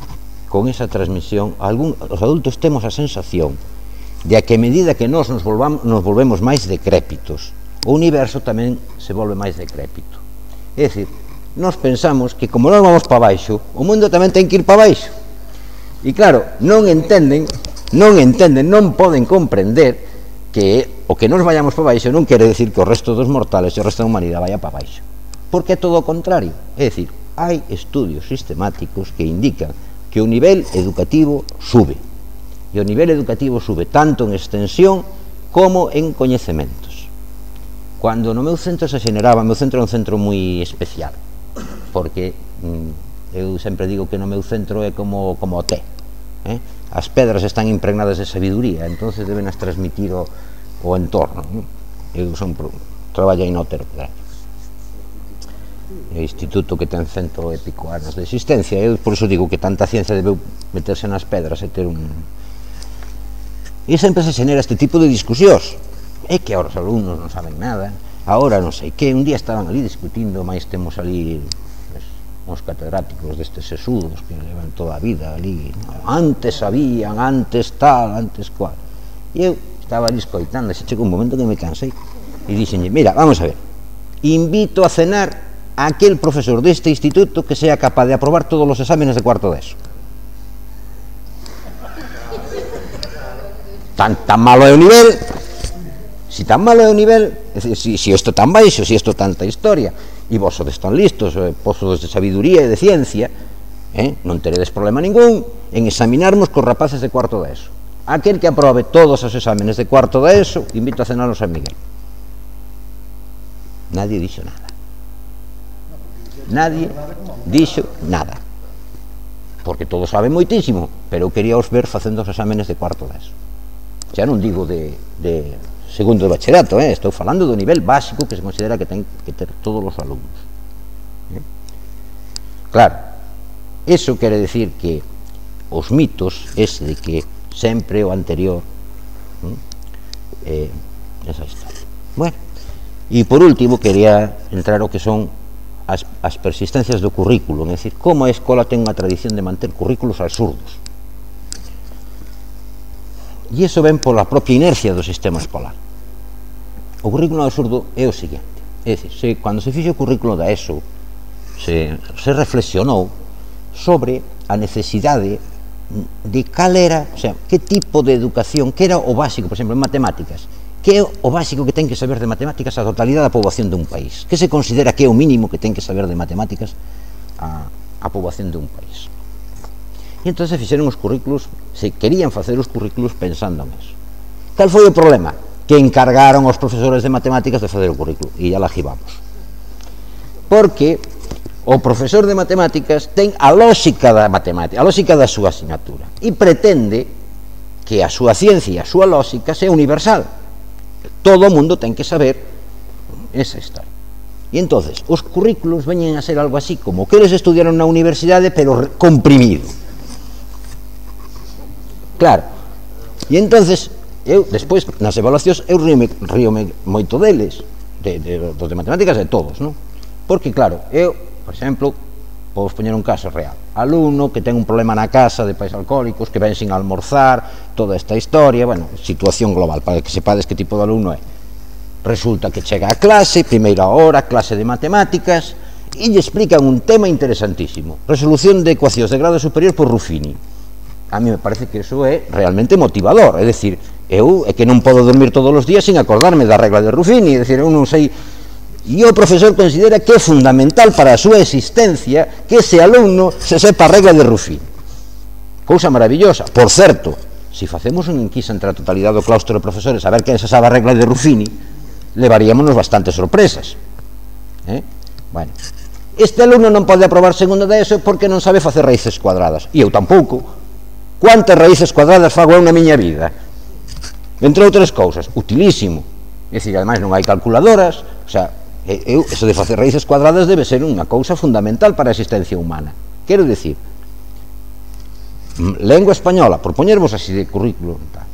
Speaker 2: con esa transmisión. Algún, os adultos temos a sensación de que a medida que nós nos, volvamos, nos volvemos máis decrépitos, o universo tamén se volve máis decrépito. É dicir, nós pensamos que como nós vamos para baixo, o mundo tamén ten que ir para baixo. E claro, non entenden, non entenden, non poden comprender que o que nos vayamos para baixo non quere decir que o resto dos mortales e o resto da humanidade vaya para baixo, porque é todo o contrario. É dicir, hai estudios sistemáticos que indican que o nivel educativo sube, e o nivel educativo sube tanto en extensión como en coñecementos. Cando no meu centro se xeneraba, o meu centro é un centro moi especial, porque mm, eu sempre digo que no meu centro é como, como o té, eh? As pedras están impregnadas de sabiduría, entonces deben as transmitir o o entorno, non? Eu son pro, traballei no Otero Pedraño, o instituto que ten cento e pico anos de existencia. Eu por iso digo que tanta ciencia debeu meterse nas pedras e ter un... E sempre se xenera este tipo de discusións. É que ahora os alumnos non saben nada, agora non sei que, un día estaban ali discutindo, máis temos ali pues, uns catedráticos destes sesudos que levan toda a vida ali, antes sabían, antes tal, antes cual. E eu estaba ali escoitando, se chegou un momento que me cansei e dixenlle, mira, vamos a ver, invito a cenar a aquel profesor deste instituto que sea capaz de aprobar todos os exámenes de cuarto de eso. Tan, tan malo é o nivel, si tan malo é o nivel, si, si isto tan baixo, si isto tanta historia, e vos sodes tan listos, eh, posos de sabiduría e de ciencia, eh, non teredes problema ningún en examinarmos cos rapaces de cuarto de eso. Aquel que aprobe todos os exámenes de cuarto de eso, invito a cenar a San Miguel. Nadie dixo nada. Nadie dixo nada. Porque todos saben moitísimo, pero eu quería os ver facendo os exámenes de cuarto de eso. Xa non digo de, de segundo de bachillerato, eh? Estou falando do nivel básico que se considera que ten que ter todos os alumnos. Eh? Claro, eso quere decir que os mitos, ese de que sempre o anterior, eh, esa historia. Bueno, e por último quería entrar o que son as, as persistencias do currículo, é dicir, como a escola ten unha tradición de manter currículos absurdos, e iso ven pola propia inercia do sistema escolar. O currículo absurdo é o seguinte, é dicir, se, cando se fixo o currículo da ESO se, se reflexionou sobre a necesidade de cal era, o sea, que tipo de educación, que era o básico, por exemplo, en matemáticas, que é o básico que ten que saber de matemáticas a totalidade da poboación dun país, que se considera que é o mínimo que ten que saber de matemáticas a, a poboación dun país. E entón se fixeron os currículos, se querían facer os currículos pensando nisso. Cal foi o problema? Que encargaron aos profesores de matemáticas de facer o currículo, e ya la jibamos. Porque o profesor de matemáticas ten a lógica da matemática, a lógica da súa asignatura, e pretende que a súa ciencia e a súa lógica sea universal. Todo o mundo ten que saber esa historia. E entonces os currículos veñen a ser algo así como que eles estudiaron na universidade pero comprimido. Claro. E entonces eu despois nas evaluacións eu ríome, ríome moito deles, de, de, dos de matemáticas de todos, non? Porque claro, eu, por exemplo, podes poñer un caso real, alumno que ten un problema na casa de pais alcohólicos, que ven sin almorzar, toda esta historia, bueno, situación global, para que sepades que tipo de alumno é. Resulta que chega a clase, primeira hora, clase de matemáticas, e lle explican un tema interesantísimo, resolución de ecuacións de grado superior por Ruffini. A mí me parece que iso é realmente motivador, é dicir, eu é que non podo dormir todos os días sin acordarme da regla de Ruffini, é dicir, eu non sei, e o profesor considera que é fundamental para a súa existencia que ese alumno se sepa a regla de Ruffini. Cousa maravillosa. Por certo, se facemos un enquisa entre a totalidade do claustro de profesores a ver quen se sabe a regla de Ruffini, levaríamonos bastantes sorpresas. Eh? Bueno, este alumno non pode aprobar segundo de eso porque non sabe facer raíces cuadradas, e eu tampouco. Quantas raíces cuadradas fago eu na miña vida? Entre outras cousas, utilísimo. É dicir, ademais non hai calculadoras, o sea, eu, eso de facer raíces cuadradas debe ser unha cousa fundamental para a existencia humana. Quero dicir, lengua española, por poñervos así de currículo tal.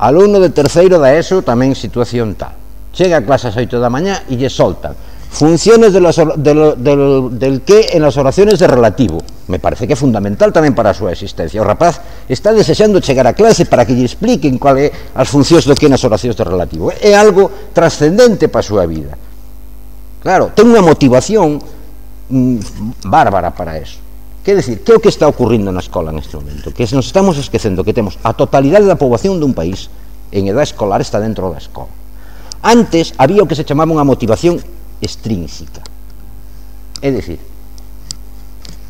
Speaker 2: Alumno de terceiro da ESO, tamén situación tal. Chega a clase ás oito da mañá e lle soltan funciones de las, de lo, de lo, del que en las oraciones de relativo. Me parece que é fundamental tamén para a súa existencia. O rapaz está desexando chegar a clase para que lle expliquen cual é as funcións do que nas oracións de relativo. É algo trascendente para a súa vida. Claro, ten unha motivación mm, bárbara para eso. Quer decir, que é o que está ocurrindo na escola neste momento? Que nos estamos esquecendo que temos a totalidade da poboación dun país en edad escolar está dentro da escola. Antes había o que se chamaba unha motivación extrínseca. É dicir,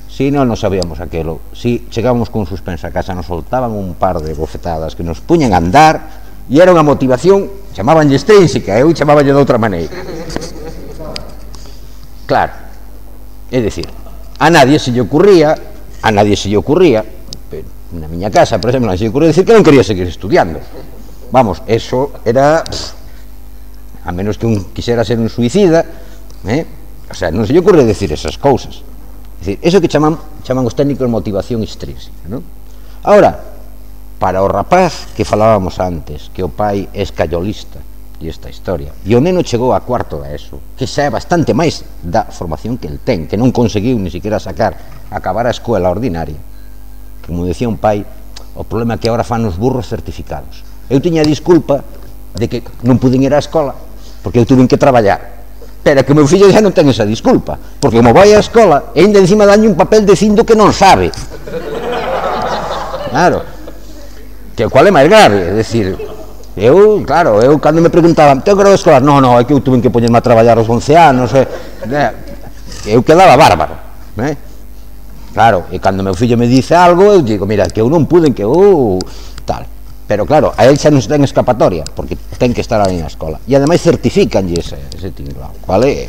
Speaker 2: si non nos sabíamos aquelo, si chegábamos con suspensa a casa, nos soltaban un par de bofetadas que nos puñan a andar, e era unha motivación, chamabanlle extrínseca, eu chamabanlle de outra maneira. Claro, é dicir, a nadie se lle ocurría, a nadie se lle ocurría, na miña casa, por exemplo, non se lle ocurría decir que non quería seguir estudiando. Vamos, eso era... Pff, a menos que un quixera ser un suicida, eh? O sea, non se lle ocurre decir esas cousas. É dicir, eso que chaman, chaman os técnicos motivación extrínseca, non? Ahora, para o rapaz que falábamos antes, que o pai é escayolista, e esta historia, e o neno chegou a cuarto da ESO, que xa é bastante máis da formación que el ten, que non conseguiu ni siquiera sacar, acabar a escola ordinaria. Como decía un pai, o problema é que agora fan os burros certificados. Eu tiña a disculpa de que non puden ir á escola, porque eu tuve que traballar, pero que o meu fillo xa non ten esa disculpa, porque como vai á escola e ainda encima dañe un papel dicindo que non sabe. Claro, que o cual é máis grave, é dicir, eu, claro, eu cando me preguntaban, tengo grado escolar? Non, non, é que eu tuve que poñerme a traballar aos once anos, eh, eu quedaba bárbaro, eh? Claro, e cando meu fillo me dice algo, eu digo, mira, que eu non pude, que eu, tal. Pero claro, a él xa non se ten escapatoria, porque ten que estar ali na escola. E ademais certificanlle ese, ese tinglao, cual é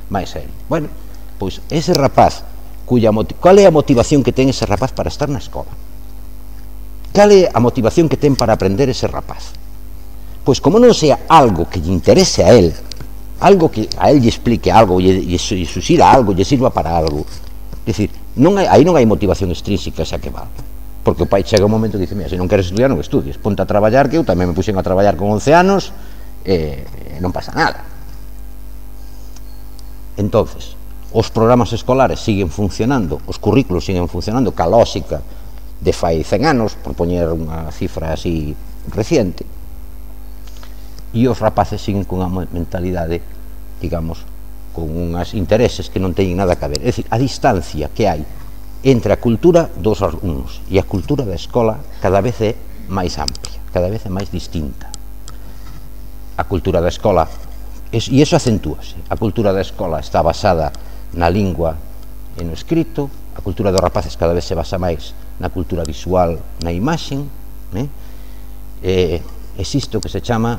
Speaker 2: máis serio. Bueno, pois ese rapaz, cuya cual é a motivación que ten ese rapaz para estar na escola? Cal é a motivación que ten para aprender ese rapaz? Pois como non sea algo que lle interese a él, algo que a él lle explique algo, lle, lle susira algo, lle sirva para algo. É dicir, non hai, aí non hai motivación extrínseca xa que vale. Porque o pai chega un momento e dice, mira, se non queres estudiar, non estudies, ponte a traballar, que eu tamén me puxen a traballar con once anos e non pasa nada. Entonces, os programas escolares siguen funcionando, os currículos siguen funcionando ca lógica de fai cen anos, por poñer unha cifra así reciente, e os rapaces siguen con unha mentalidade, digamos, con unhas intereses que non teñen nada que ver. É dicir, a distancia que hai entre a cultura dos alumnos e a cultura da escola cada vez é máis amplia, cada vez é máis distinta. A cultura da escola, e iso acentúase, a cultura da escola está basada na lingua e no escrito, a cultura dos rapaces cada vez se basa máis na cultura visual, na imaxen, eh? Eh, existe o que se chama,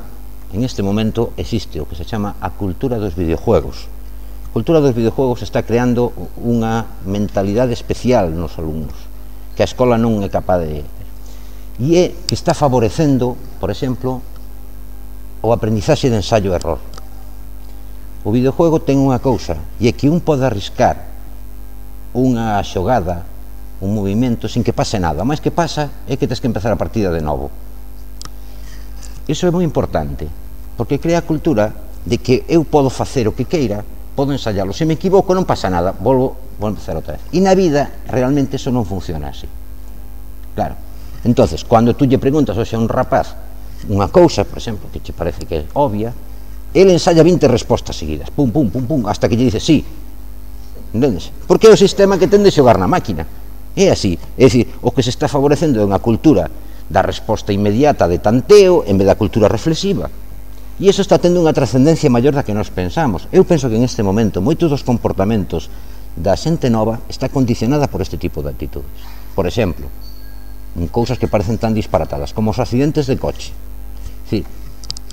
Speaker 2: en este momento existe o que se chama a cultura dos videojuegos. A cultura dos videojuegos está creando unha mentalidade especial nos alumnos, que a escola non é capaz de... E é que está favorecendo, por exemplo, o aprendizaxe de ensayo e error. O videojuego ten unha cousa, e é que un pode arriscar unha xogada, un movimento, sin que pase nada. O máis que pasa é que tens que empezar a partida de novo. Iso é moi importante, porque crea a cultura de que eu podo facer o que queira, podo ensayalo, se me equivoco non pasa nada, volvo, volvo a empezar outra vez. E na vida, realmente, eso non funciona así. Claro. Entonces, cando tú lle preguntas hoxe a un rapaz unha cousa, por exemplo, que che parece que é obvia, ele ensaya vinte respostas seguidas, pum, pum, pum, pum, hasta que lle dice sí, entendes? Porque é o sistema que ten de xogar na máquina, é así, é dicir, o que se está favorecendo é unha cultura da resposta inmediata de tanteo en vez da cultura reflexiva, e iso está tendo unha trascendencia maior da que nos pensamos. Eu penso que en este momento moitos dos comportamentos da xente nova está condicionada por este tipo de actitudes. Por exemplo, en cousas que parecen tan disparatadas como os accidentes de coche. É dicir,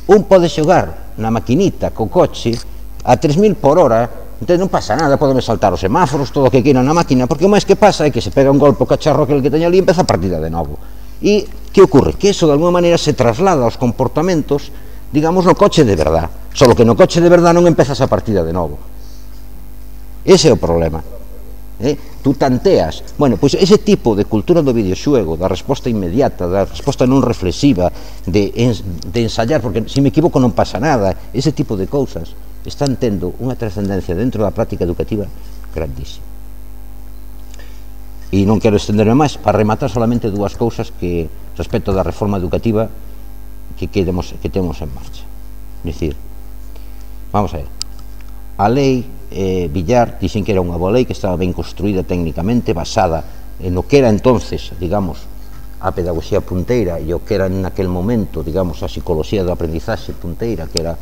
Speaker 2: un pode xogar na maquinita co coche a tres mil por hora, entón non pasa nada, podeme saltar os semáforos, todo o que queiran na máquina, porque o máis que pasa é que se pega un golpe o cacharro aquel que teña ali e empeza a partida de novo. E que ocorre? Que iso de alguma maneira se traslada aos comportamentos, digamos, no coche de verdad, só que no coche de verdad non empezas a partida de novo. Ese é o problema. Eh? Tú tanteas, bueno, pois ese tipo de cultura do videoxuego, da resposta inmediata, da resposta non reflexiva, de, ens, de ensayar, porque se me equivoco non pasa nada, ese tipo de cousas están tendo unha trascendencia dentro da práctica educativa grandísima. E non quero estenderme máis, para rematar solamente dúas cousas que respecto da reforma educativa que, quedemos, que temos en marcha. É dicir, vamos a ver, a lei eh, Villar dixen que era unha boa lei que estaba ben construída técnicamente, basada en o que era entonces, digamos, a pedagogía punteira e o que era en aquel momento, digamos, a psicología do aprendizaxe punteira, que era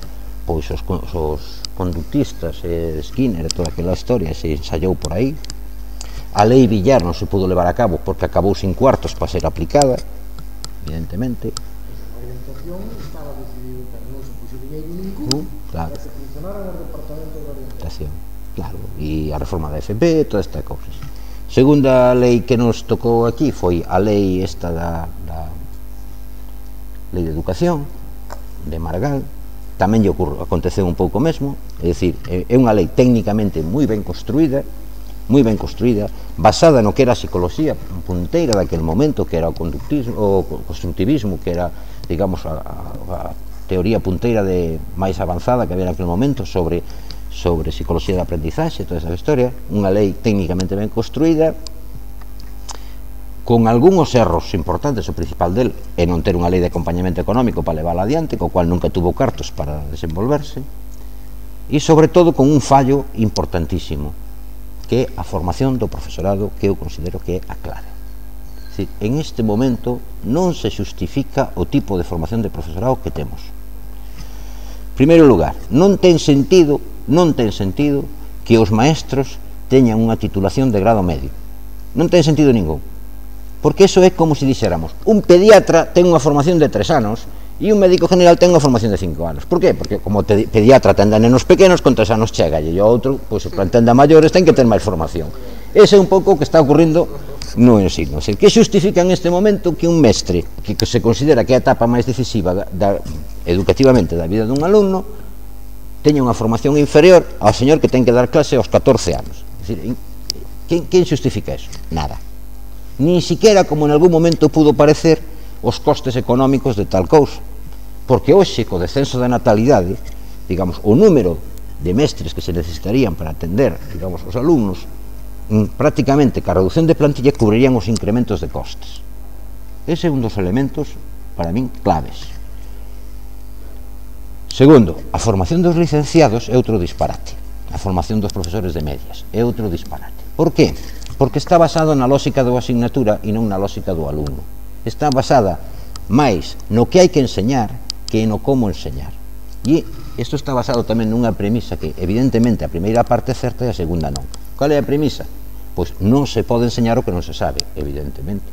Speaker 2: pois os, os conductistas, eh, Skinner e toda aquela historia, se ensayou por aí. A lei Villar non se pudo levar a cabo porque acabou sin cuartos para ser aplicada, evidentemente.
Speaker 3: A orientación estaba decidido, pero non se puxo dinheiro ningún,
Speaker 2: claro.
Speaker 3: para que funcionaran os departamentos de orientación.
Speaker 2: Claro, e a reforma da F P, todas estas cousas. Segunda lei que nos tocou aquí foi a lei esta da, da lei de educación de Margal. Tamén lle ocurre, aconteceu un pouco mesmo, é dicir, é unha lei técnicamente moi ben construída, moi ben construída, basada no que era a psicología punteira daquel momento, que era o conductismo, o constructivismo, que era, digamos, a, a, a teoría punteira de máis avanzada que había naquel momento sobre sobre psicología de aprendizaxe, toda esa historia, unha lei técnicamente ben construída, con algúns erros importantes. O principal del é non ter unha lei de acompañamento económico para levála adiante, co cual nunca tuvo cartos para desenvolverse, e sobre todo con un fallo importantísimo, que é a formación do profesorado, que eu considero que é a clave. É dicir, en este momento non se xustifica o tipo de formación de profesorado que temos. En primeiro lugar, non ten sentido, non ten sentido que os maestros teñan unha titulación de grado medio. Non ten sentido ningún. Porque eso é como se dixéramos, un pediatra ten unha formación de tres anos e un médico general ten unha formación de cinco anos. Por qué? Porque como te, pediatra atende a nenos pequenos, con tres anos chega, e o outro, pois, se atende a maiores, ten que ter máis formación. Ese é un pouco o que está ocurrindo no ensino. Que xustifica en este momento que un mestre, que, que se considera que é a etapa máis decisiva da, da, educativamente da vida dun alumno, teña unha formación inferior ao señor que ten que dar clase aos catorce anos. É dicir, quen, quen xustifica eso? Nada. Ni siquiera, como en algún momento pudo parecer, os costes económicos de tal cousa, porque hoxe, co descenso da natalidade, digamos, o número de mestres que se necesitarían para atender, digamos, os alumnos, prácticamente, ca reducción de plantilla, cubrirían os incrementos de costes. Ese é un dos elementos, para min, claves. Segundo, a formación dos licenciados é outro disparate. A formación dos profesores de medias é outro disparate. Por qué? Porque está basado na lógica da asignatura e non na lógica do alumno. Está basada máis no que hai que enseñar que no como enseñar. E isto está basado tamén nunha premisa que, evidentemente, a primeira parte é certa e a segunda non. Cal é a premisa? Pois non se pode enseñar o que non se sabe, evidentemente.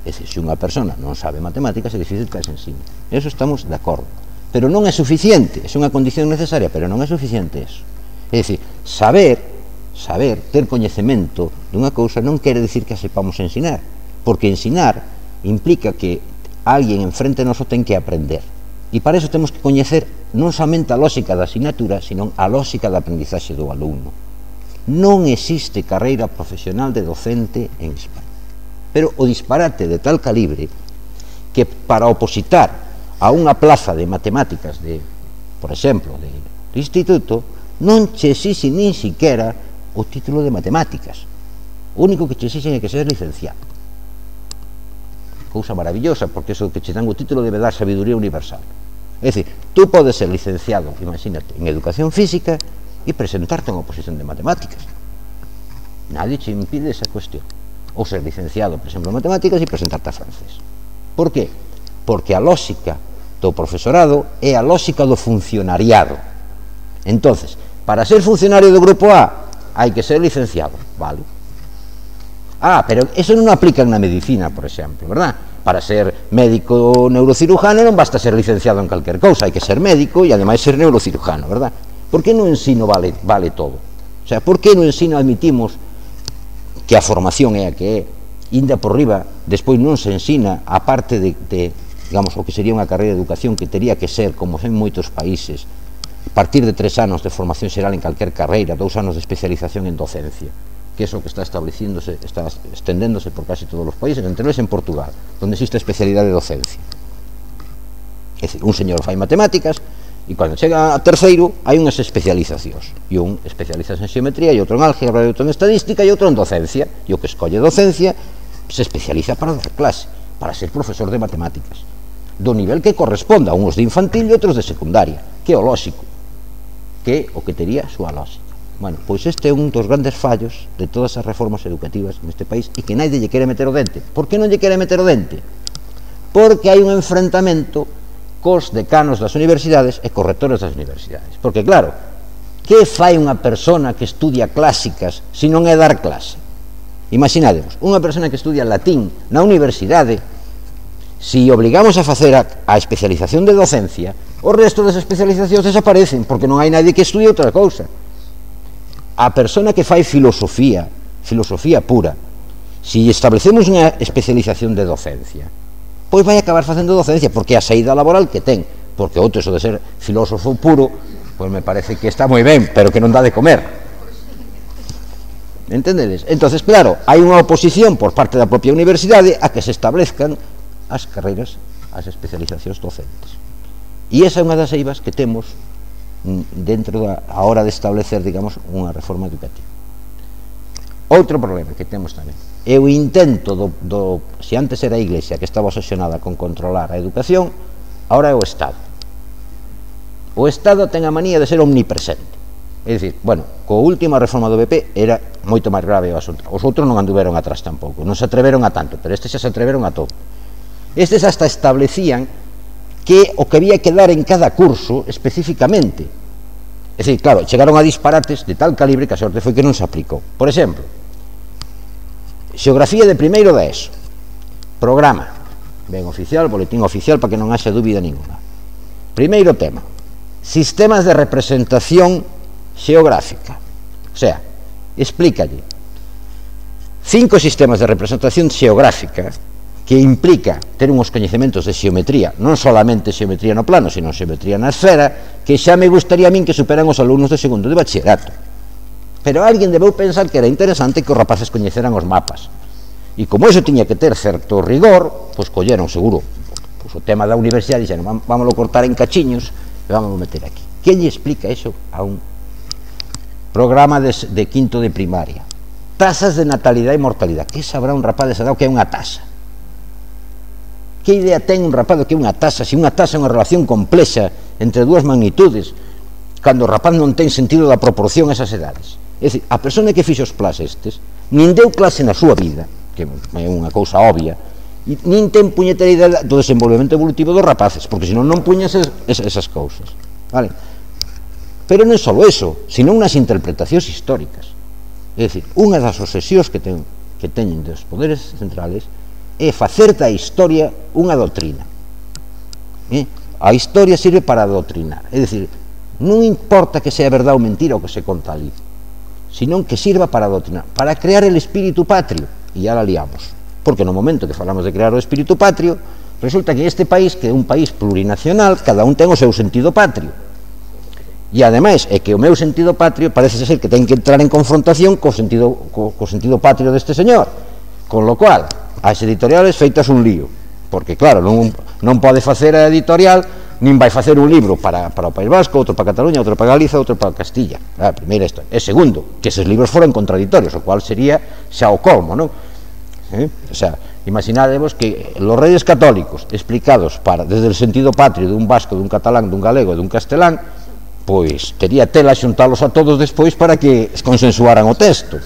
Speaker 2: É dicir, se unha persona non sabe matemáticas, é difícil que se ensine. Eso estamos de acordo. Pero non é suficiente, é unha condición necesaria, pero non é suficiente eso. É dicir, saber... saber, ter coñecemento dunha cousa non quere dicir que a sepamos ensinar, porque ensinar implica que alguén enfrente noso ten que aprender, e para eso temos que coñecer non somente a lógica da asignatura, sino a lógica da aprendizaxe do alumno. Non existe carreira profesional de docente en España, pero o disparate de tal calibre que para opositar a unha plaza de matemáticas de, por exemplo, de, de instituto, non che exixe nin siquiera o título de matemáticas. O único que che exixen é que seas licenciado. Cousa maravillosa, porque eso que che dan o título debe dar sabiduría universal. É dicir, tú podes ser licenciado, imagínate, en educación física e presentarte en oposición de matemáticas. Nadie te impide esa cuestión. Ou ser licenciado, por exemplo, en matemáticas e presentarte a francés. Por qué? Porque a lógica do profesorado é a lógica do funcionariado. Entonces, para ser funcionario do grupo A hai que ser licenciado, vale? Ah, pero eso non aplica na medicina, por exemplo, verdad? Para ser médico neurocirujano non basta ser licenciado en calquer cousa, hai que ser médico e ademais ser neurocirujano, verdad? Por que no ensino vale, vale todo? O sea, por que no ensino admitimos que a formación é a que é, inda por riba, despois non se ensina, a parte de, de, digamos, o que sería unha carreira de educación que teria que ser, como en moitos países, a partir de tres anos de formación xeral en calquer carreira, dous anos de especialización en docencia, que é o que está estableciéndose, está estendéndose por casi todos os países, entre eles en Portugal, onde existe a especialidade de docencia. É dicir, un señor fai matemáticas, e cando chega a terceiro hai unhas especializacións, e un especializa en xeometría, e outro en álgebra, e outro en estadística, e outro en docencia, e o que escolle docencia se especializa para dar clase, para ser profesor de matemáticas, do nivel que corresponda a uns de infantil e outros de secundaria, que é o lóxico, que é o que tería a súa lógica. Bueno, pois este é un dos grandes fallos de todas as reformas educativas neste país e que naide lle quere meter o dente. Por que non lle quere meter o dente? Porque hai un enfrentamento cos decanos das universidades e cos rectores das universidades. Porque, claro, que fai unha persona que estudia clásicas se non é dar clase? Imaginademos, unha persona que estudia latín na universidade, se obligamos a facer a, a especialización de docencia, o resto das especializacións desaparecen, porque non hai nadie que estudie outra cousa. A persona que fai filosofía, filosofía pura, se establecemos unha especialización de docencia, pois vai acabar facendo docencia, porque é a saída laboral que ten, porque outro, eso de ser filósofo puro, pois me parece que está moi ben, pero que non dá de comer. Entendedes? Entonces, claro, hai unha oposición por parte da propia universidade a que se establezcan as carreiras, as especializacións docentes. E esa é unha das eivas que temos dentro da a hora de establecer, digamos, unha reforma educativa. Outro problema que temos tamén é o intento do, do se antes era a Iglesia que estaba obsesionada con controlar a educación, agora é o Estado. O Estado ten a manía de ser omnipresente. É dicir, bueno, coa última reforma do B P era moito máis grave o asunto. Os outros non anduveron atrás tampouco, non se atreveron a tanto, pero estes xa se atreveron a todo. Estes hasta establecían que o que había que dar en cada curso especificamente. É dicir, claro, chegaron a disparates de tal calibre que a sorte foi que non se aplicou. Por exemplo, xeografía de primeiro da ESO, programa, ben oficial, boletín oficial, para que non haxa dúbida ninguna. Primeiro tema, sistemas de representación xeográfica. O sea, explícalle cinco sistemas de representación xeográfica que implica ter uns coñecementos de xeometría, non solamente xeometría no plano, sino xeometría na esfera, que xa me gustaría a min que superan os alumnos de segundo de bachillerato. Pero alguén debeu pensar que era interesante que os rapaces coñeceran os mapas. E como iso tiña que ter certo rigor, pois colleron seguro pois o tema da universidade, dixeron, vámoslo cortar en cachiños e vámoslo meter aquí. Que lle explica iso a un programa de, de quinto de primaria? Tasas de natalidade e mortalidade. Que sabrá un rapaz desa edad o que é unha tasa? Que idea ten un rapaz do que é unha tasa? Se unha tasa é unha relación complexa entre dúas magnitudes, cando o rapaz non ten sentido da proporción a esas edades. É dicir, a persona que fixo os plas estes nin deu clase na súa vida, que é unha cousa obvia, nin ten puñetera idea do desenvolvemento evolutivo dos rapaces, porque senón non puñas esas, esas cousas, vale? Pero non é só eso, senón unhas interpretacións históricas. É dicir, unha das obsesións que, ten, que teñen dos poderes centrales é facer da historia unha doutrina. Eh? A historia sirve para adoctrinar, é dicir, non importa que sea verdade ou mentira o que se conta ali, senón que sirva para adoctrinar, para crear el espírito patrio, e ya la liamos, porque no momento que falamos de crear o espírito patrio, resulta que este país, que é un país plurinacional, cada un ten o seu sentido patrio, e ademais é que o meu sentido patrio parece ser que ten que entrar en confrontación co sentido, co, co sentido patrio deste señor, con lo cual as editoriales feitas un lío, porque claro, non, non pode facer a editorial, nin vai facer un libro para, para o País Vasco, outro para Cataluña, outro para Galiza, outro para Castilla. A primeira historia. E segundo, que eses libros foran contradictorios, o cual sería xa o colmo, non? Eh? O sea, Imaginadevos que los reyes católicos explicados para, desde el sentido patrio dun vasco, dun catalán, dun galego e dun castelán, pois tería tela xuntalos a todos despois para que consensuaran o texto.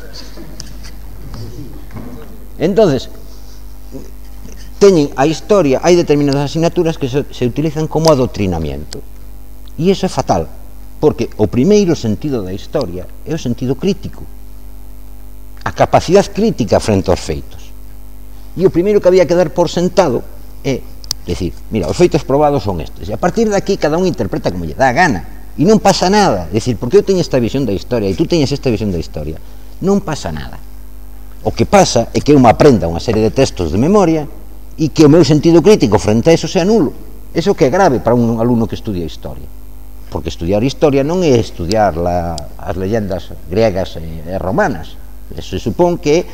Speaker 2: Entonces, teñen a historia, hai determinadas asignaturas que se, se utilizan como adoctrinamiento, e iso é fatal, porque o primeiro sentido da historia é o sentido crítico, a capacidade crítica frente aos feitos. E o primeiro que había que dar por sentado é decir, mira, os feitos probados son estes, e a partir de aquí cada un interpreta como lle dá a gana, e non pasa nada. Decir, porque eu teño esta visión da historia e tú teñes esta visión da historia, non pasa nada. O que pasa é que eu me aprenda unha serie de textos de memoria e que o meu sentido crítico frente a eso sea nulo. Eso que é grave para un alumno que estudia historia, porque estudiar historia non é estudiar la, as leyendas griegas e, e romanas. Eso se supón que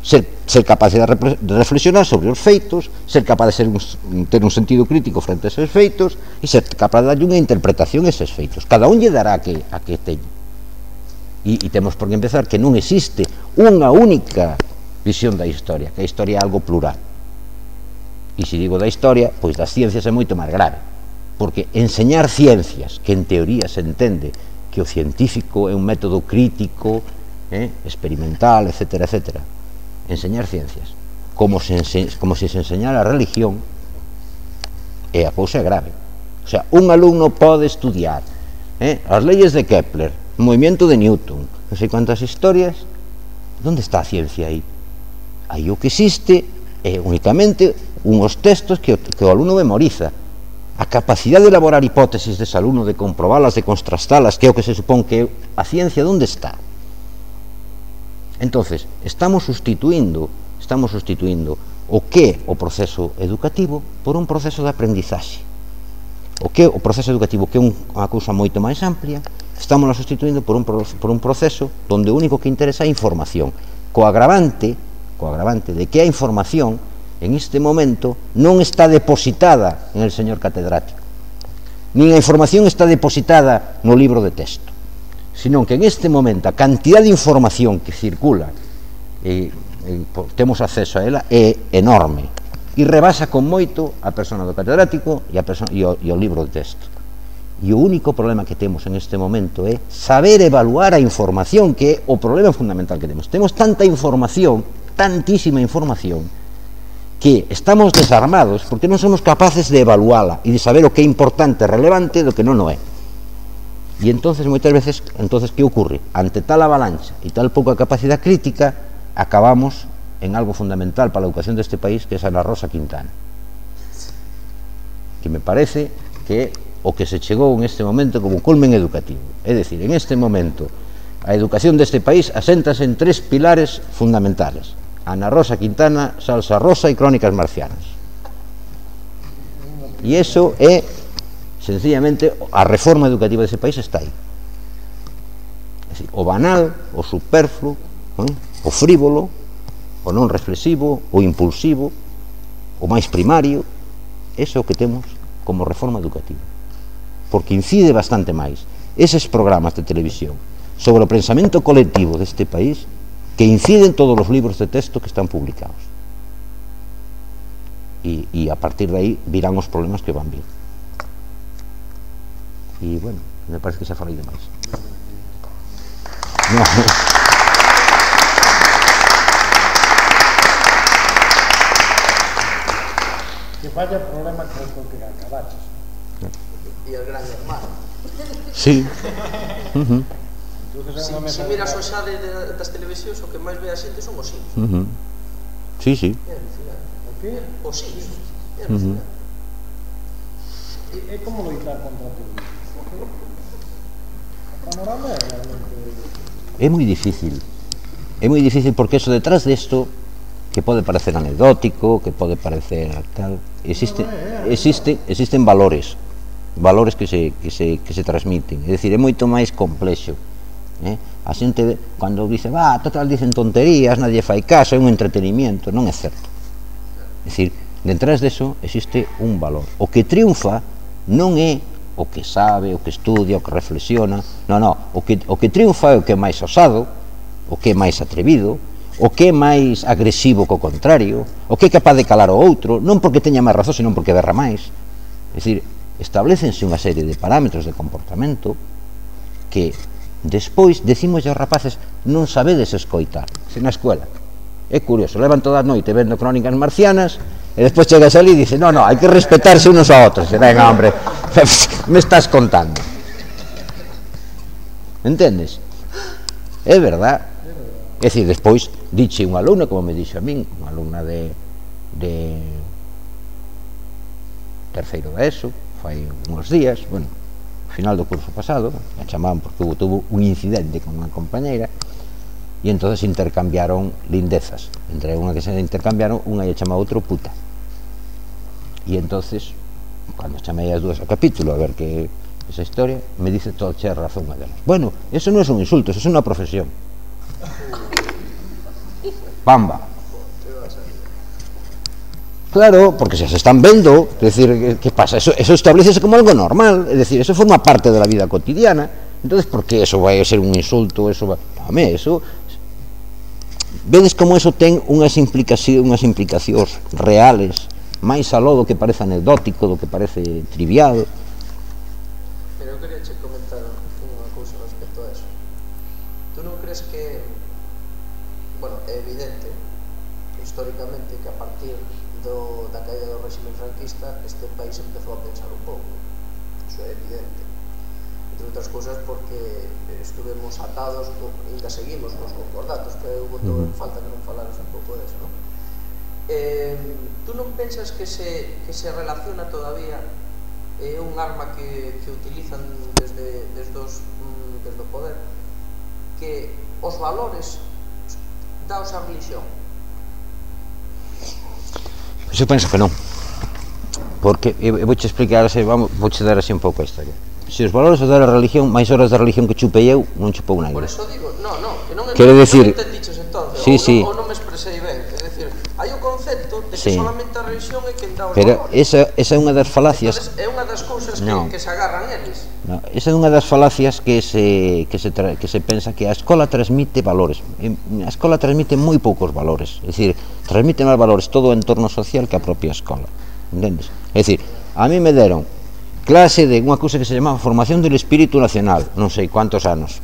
Speaker 2: ser, ser capaz de reflexionar sobre os feitos, ser capaz de ser un, ter un sentido crítico frente a esos feitos e ser capaz de darlle unha interpretación a esos feitos. Cada un lle dará a que, a que teña. E, e temos por que empezar que non existe unha única visión da historia, que a historia é algo plural. E se digo da historia, pois das ciencias é moito máis grave, porque enseñar ciencias, que en teoría se entende que o científico é un método crítico, eh, experimental, etcétera, etcétera, enseñar ciencias como se, como se se enseñara a religión, é a cousa grave. O sea, un alumno pode estudiar eh, as leyes de Kepler, o movimiento de Newton, non sei quantas historias. Onde está a ciencia aí? Aí o que existe é únicamente unhos textos que o, que o alumno memoriza. A capacidade de elaborar hipótesis dese alumno, de comprobalas, de contrastalas, que é o que se supón que é a ciencia, onde está? Entonces, estamos sustituindo, estamos sustituindo o que é o proceso educativo por un proceso de aprendizaxe. O que é o proceso educativo, que é unha cousa moito máis amplia, estamos a sustituindo por un, por un proceso onde o único que interesa é a información, co agravante, co agravante de que a información en este momento non está depositada en el señor catedrático, nin a información está depositada no libro de texto, sino que en este momento a cantidad de información que circula e, e temos acceso a ela é enorme e rebasa con moito a persona do catedrático e, a persona, e, o, e o libro de texto. E o único problema que temos en este momento é saber evaluar a información, que é o problema fundamental que temos. Temos tanta información, tantísima información, que estamos desarmados porque non somos capaces de evaluala e de saber o que é importante, relevante, do que non o é. E entonces, moitas veces, entonces, que ocurre? Ante tal avalancha e tal pouca capacidade crítica, acabamos en algo fundamental para a educación deste país, que é Ana Rosa Quintana, que me parece que é o que se chegou en este momento como culmen educativo. É dicir, en este momento a educación deste país aséntase en tres pilares fundamentales: Ana Rosa Quintana, Salsa Rosa e Crónicas Marcianas. E iso é, sencillamente, a reforma educativa dese país está aí. É dicir, o banal, o superfluo, ¿eh? O frívolo, o non reflexivo, o impulsivo, o máis primario, ese é o que temos como reforma educativa, porque incide bastante máis eses programas de televisión sobre o pensamento colectivo deste país que inciden todos os libros de texto que están publicados. E, e a partir de aí virán os problemas que van vir. E, bueno, me parece que xa falei demais. No.
Speaker 3: Que vaya problema que es que acabaches.
Speaker 4: E el gran hermano.
Speaker 2: Sí. Uh-huh.
Speaker 4: Si, si miras o xa de, de, das televisións, o que máis ve a xente son os Sims.
Speaker 2: Uh-huh. Sí, sí.
Speaker 4: É alucinante.
Speaker 3: O que?
Speaker 4: Os Sims. É
Speaker 2: Uh-huh.
Speaker 4: alucinante.
Speaker 3: É como loitar contra todo isto. O panorama é realmente...
Speaker 2: É moi difícil. É moi difícil porque eso detrás desto, que pode parecer anecdótico, que pode parecer tal, existe, existe, existen valores, valores que se, que se, que se transmiten. É dicir, é moito máis complexo. Eh? A xente, cando dice, va, total, dicen tonterías, nadie fai caso, é un entretenimiento, non é certo. É dicir, detrás deso existe un valor. O que triunfa non é o que sabe, o que estudia, o que reflexiona, non, non, o que, o que triunfa é o que é máis osado, o que é máis atrevido, o que é máis agresivo co contrario, o que é capaz de calar o outro, non porque teña máis razón, senón porque berra máis. É dicir, establecense unha serie de parámetros de comportamento que despois decimos aos rapaces non sabedes escoitar, se na escuela. É curioso, levan toda a noite vendo crónicas marcianas e despois chegas ali e dices, no, no, hai que respetarse unos a outros. E venga, hombre, me estás contando. Entendes? É verdad. É dicir, despois diche unha alumna, como me dixo a min, unha alumna de, de terceiro da ESO, fai uns días, bueno, ao final do curso pasado, a chamaban porque hubo, tuvo un incidente con unha compañeira e entonces intercambiaron lindezas. Entre unha que se intercambiaron, unha lle chamaba outro puta. E entonces, cando chamei as dúas ao capítulo a ver que esa historia, me dice todo che razón a delas. Bueno, eso non é un insulto, eso é unha profesión. Pamba. Claro, porque se se están vendo, é dicir, que pasa? Eso, eso establecese como algo normal, é dicir, eso forma parte de la vida cotidiana. Entonces, por que eso vai a ser un insulto? Eso va... Home, eso... Vedes como eso ten unhas implicacións, unhas implicacións reales, máis aló do que parece anecdótico, do que parece trivial.
Speaker 4: Pero eu queria che comentar unha cousa respecto a eso. Tú non crees que, bueno, é evidente, históricamente, que a partir do, da caída do réxime franquista este país empezou a pensar un pouco? Iso é evidente. Entre outras cousas porque estuvemos atados, ainda seguimos nos concordatos, que eu botou en falta que non falaras un pouco deso, non? Eh, tú non pensas que se, que se relaciona todavía é eh, un arma que, que utilizan desde, desde, os, desde o poder, que os valores daos a religión?
Speaker 2: Eu penso que non, porque eu vou te explicar, vamos, vou te dar así un pouco a historia. Se os valores os da religión, máis horas da religión que chupei eu, non chupou nadie.
Speaker 4: Por eso digo, no, no, que non entendiches entonces,
Speaker 2: sí,
Speaker 4: ou,
Speaker 2: sí.
Speaker 4: Non, ou non me expresei ben, é dicir, hai o concepto de que
Speaker 2: sí.
Speaker 4: solamente a religión é quen dá os
Speaker 2: Pero
Speaker 4: valores.
Speaker 2: esa, esa é unha das falacias.
Speaker 4: Entonces, é unha das cousas que,
Speaker 2: no.
Speaker 4: que se agarran eles.
Speaker 2: No, esa é unha das falacias que se, que, se tra, que se pensa que a escola transmite valores. A escola transmite moi poucos valores, é dicir, transmite máis valores todo o entorno social que a propia escola, entendes? É dicir, a mí me deron clase de unha cousa que se chamaba Formación del Espíritu Nacional, non sei cuántos anos,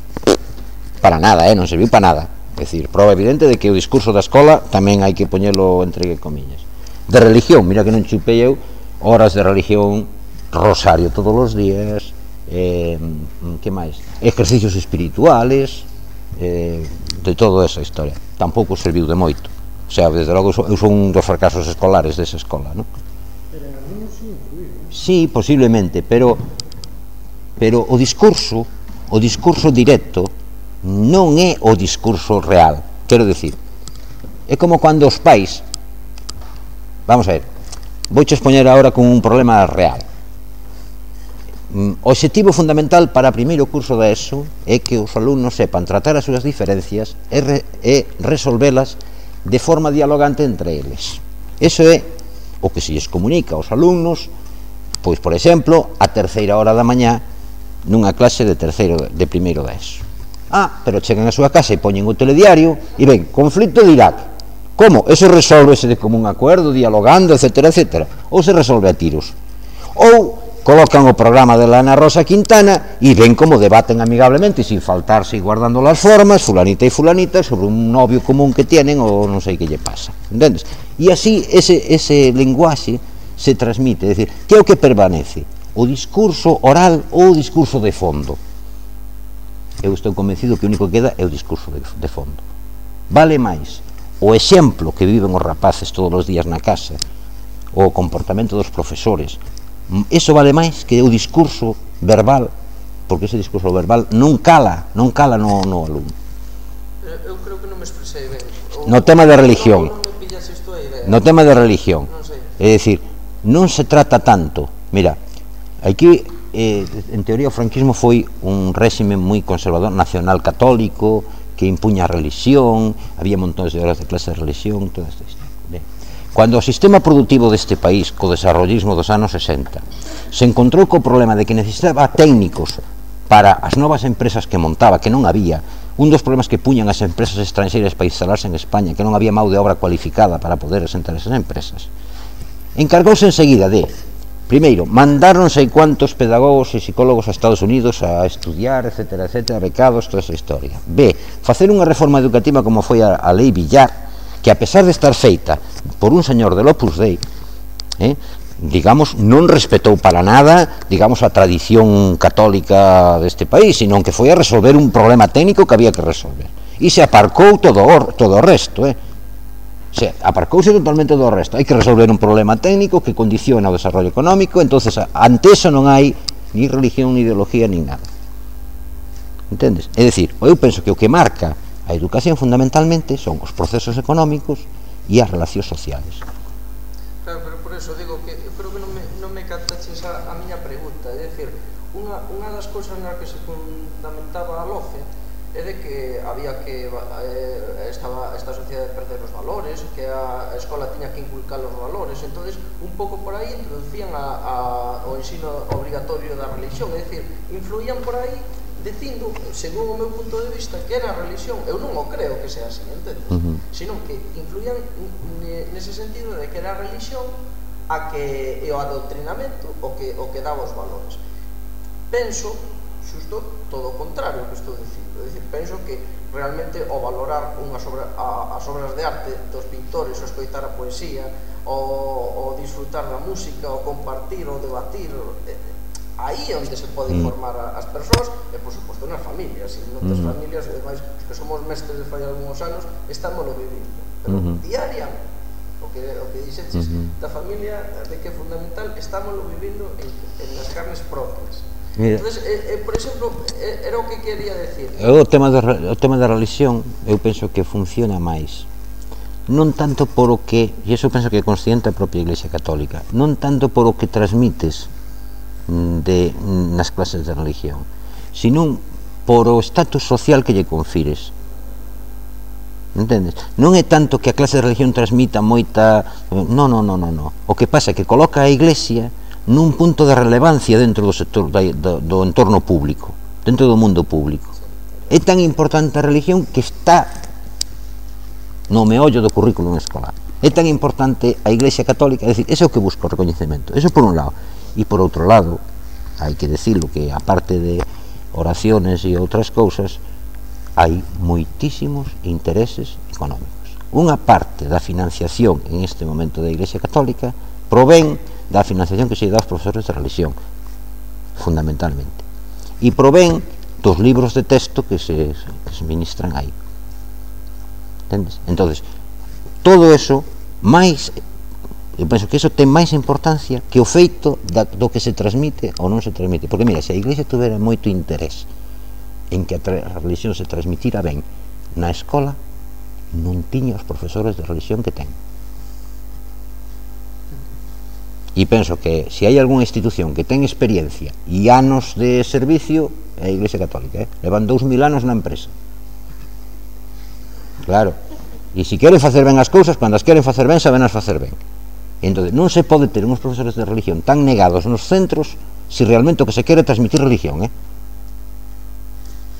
Speaker 2: para nada, eh, non serviu para nada. É dicir, prova evidente de que o discurso da escola tamén hai que poñelo entre comillas. De religión, mira que non chupei eu horas de religión, rosario todos os días, eh, que máis? Ejercicios espirituales, eh, de toda esa historia. Tampouco serviu de moito. O sea, desde logo eu son un dos fracasos escolares desa escola, non? Sí, posiblemente, pero pero o discurso, o discurso directo non é o discurso real. Quero dicir, é como cando os pais, vamos a ver, vouche expoñer agora con un problema real. O obxectivo fundamental para o primeiro curso da ESO é que os alumnos sepan tratar as súas diferencias e, re, e resolvelas de forma dialogante entre eles. Eso é o que se lles comunica aos alumnos, pois, por exemplo, a terceira hora da mañá nunha clase de terceiro de primeiro da ESO. Ah, pero chegan a súa casa e poñen o telediario e ven, conflito de Irak. Como? Eso resolvese de común acuerdo, dialogando, etcétera, etcétera. Ou se resolve a tiros. Ou colocan o programa de la Ana Rosa Quintana e ven como debaten amigablemente, sin faltarse e guardando las formas, fulanita e fulanita, sobre un novio común que tienen ou non sei que lle pasa. Entendes? E así ese, ese lenguaxe se transmite, é dicir, que é o que permanece? O discurso oral ou o discurso de fondo? Eu estou convencido que o único que queda é o discurso de, de fondo. Vale máis o exemplo que viven os rapaces todos os días na casa, o comportamento dos profesores, eso vale máis que o discurso verbal, porque ese discurso verbal non cala, non cala no, no alumno.
Speaker 4: Eu creo que non me expresei ben.
Speaker 2: No tema de religión,
Speaker 4: non me pillas isto a idea.
Speaker 2: no tema de religión,
Speaker 4: Non sei.
Speaker 2: é dicir, non se trata tanto, mira, aquí eh, en teoría o franquismo foi un réxime moi conservador, nacional católico, que impuña a religión, había montones de horas de clase de religión, todo isto. Cando o sistema productivo deste país, co desarrollismo dos anos sesenta, se encontrou co problema de que necesitaba técnicos para as novas empresas que montaba, que non había, un dos problemas que puñan as empresas estranxeiras para instalarse en España, que non había mão de obra cualificada para poder asentar esas empresas, encargouse enseguida de, primeiro, mandar non sei cuantos pedagogos e psicólogos a Estados Unidos a estudiar, etcétera, etcétera, becados, toda esa historia. B, facer unha reforma educativa como foi a, a Lei Villar, que a pesar de estar feita por un señor del Opus Dei, eh, digamos, non respetou para nada, digamos, a tradición católica deste país, sino que foi a resolver un problema técnico que había que resolver. E se aparcou todo o, todo o resto, eh. Se aparcouse totalmente do resto. Hai que resolver un problema técnico que condiciona o desarrollo económico, entonces ante eso non hai ni religión, ni ideología, ni nada. Entendes? É dicir, eu penso que o que marca a educación fundamentalmente son os procesos económicos e as relacións sociales.
Speaker 4: Claro, pero por eso digo que eu creo que non me, non me captaches a, a miña pregunta, é dicir, unha, unha das cousas na que se fundamentaba a LOCE é de que había que eh, estaba esta sociedade de perder os valores, que a, a escola tiña que inculcar os valores, entonces un pouco por aí introducían a, a, o ensino obrigatorio da religión, é dicir, influían por aí dicindo, según o meu punto de vista, que era a religión. Eu non o creo que sea así, entendes? Uh -huh. Sino que influían nese sentido de que era a religión a que e o adoctrinamento o que, o que daba os valores. Penso, xusto, todo o contrario que estou dicindo. É dicir, penso que realmente o valorar unhas obra, a, as obras de arte dos pintores, o escoitar a poesía, o, o disfrutar da música, o compartir, o debatir, eh, aí é onde se pode informar a, as persoas e, por suposto, nas familias. E noutras mm. familias, ademais, os que somos mestres de fai algúns anos, estámoslo vivindo. Pero mm -hmm. diariamente, o que, o que dixeches mm -hmm. da familia, de que é fundamental, estámoslo vivindo en, en las carnes propias. Mira. Entonces, eh, eh, por exemplo, eh, era o que quería decir.
Speaker 2: O tema, de, o tema da religión, eu penso que funciona máis. Non tanto por o que, e iso penso que é consciente a propia Iglesia Católica, non tanto por o que transmites de, nas clases de religión, sino por o estatus social que lle confires. Entendes? Non é tanto que a clase de religión transmita moita... Non, non, non, non, non. O que pasa é que coloca a Iglesia nun punto de relevancia dentro do sector do, do entorno público, dentro do mundo público. É tan importante a religión que está no meollo do currículum escolar. É tan importante a Iglesia Católica, é dicir, ese é o que busca o recoñecemento. Eso por un lado. E por outro lado, hai que decirlo que aparte de oraciones e outras cousas, hai moitísimos intereses económicos. Unha parte da financiación en este momento da Iglesia Católica provén da financiación que se dá aos profesores de religión, fundamentalmente, e provén dos libros de texto que se, que se ministran aí. Entendes? Entonces, todo eso, máis... Eu penso que iso ten máis importancia que o feito da, do que se transmite ou non se transmite. Porque, mira, se a Iglesia tuvera moito interés en que a, a religión se transmitira ben na escola, non tiña os profesores de religión que ten. E penso que se hai algunha institución que ten experiencia e anos de servicio, é a Iglesia Católica, eh? Levan dous mil anos na empresa. Claro. E se queren facer ben as cousas, cando as queren facer ben, sabenas facer ben. Entón, non se pode ter uns profesores de religión tan negados nos centros se realmente o que se quere transmitir religión, eh?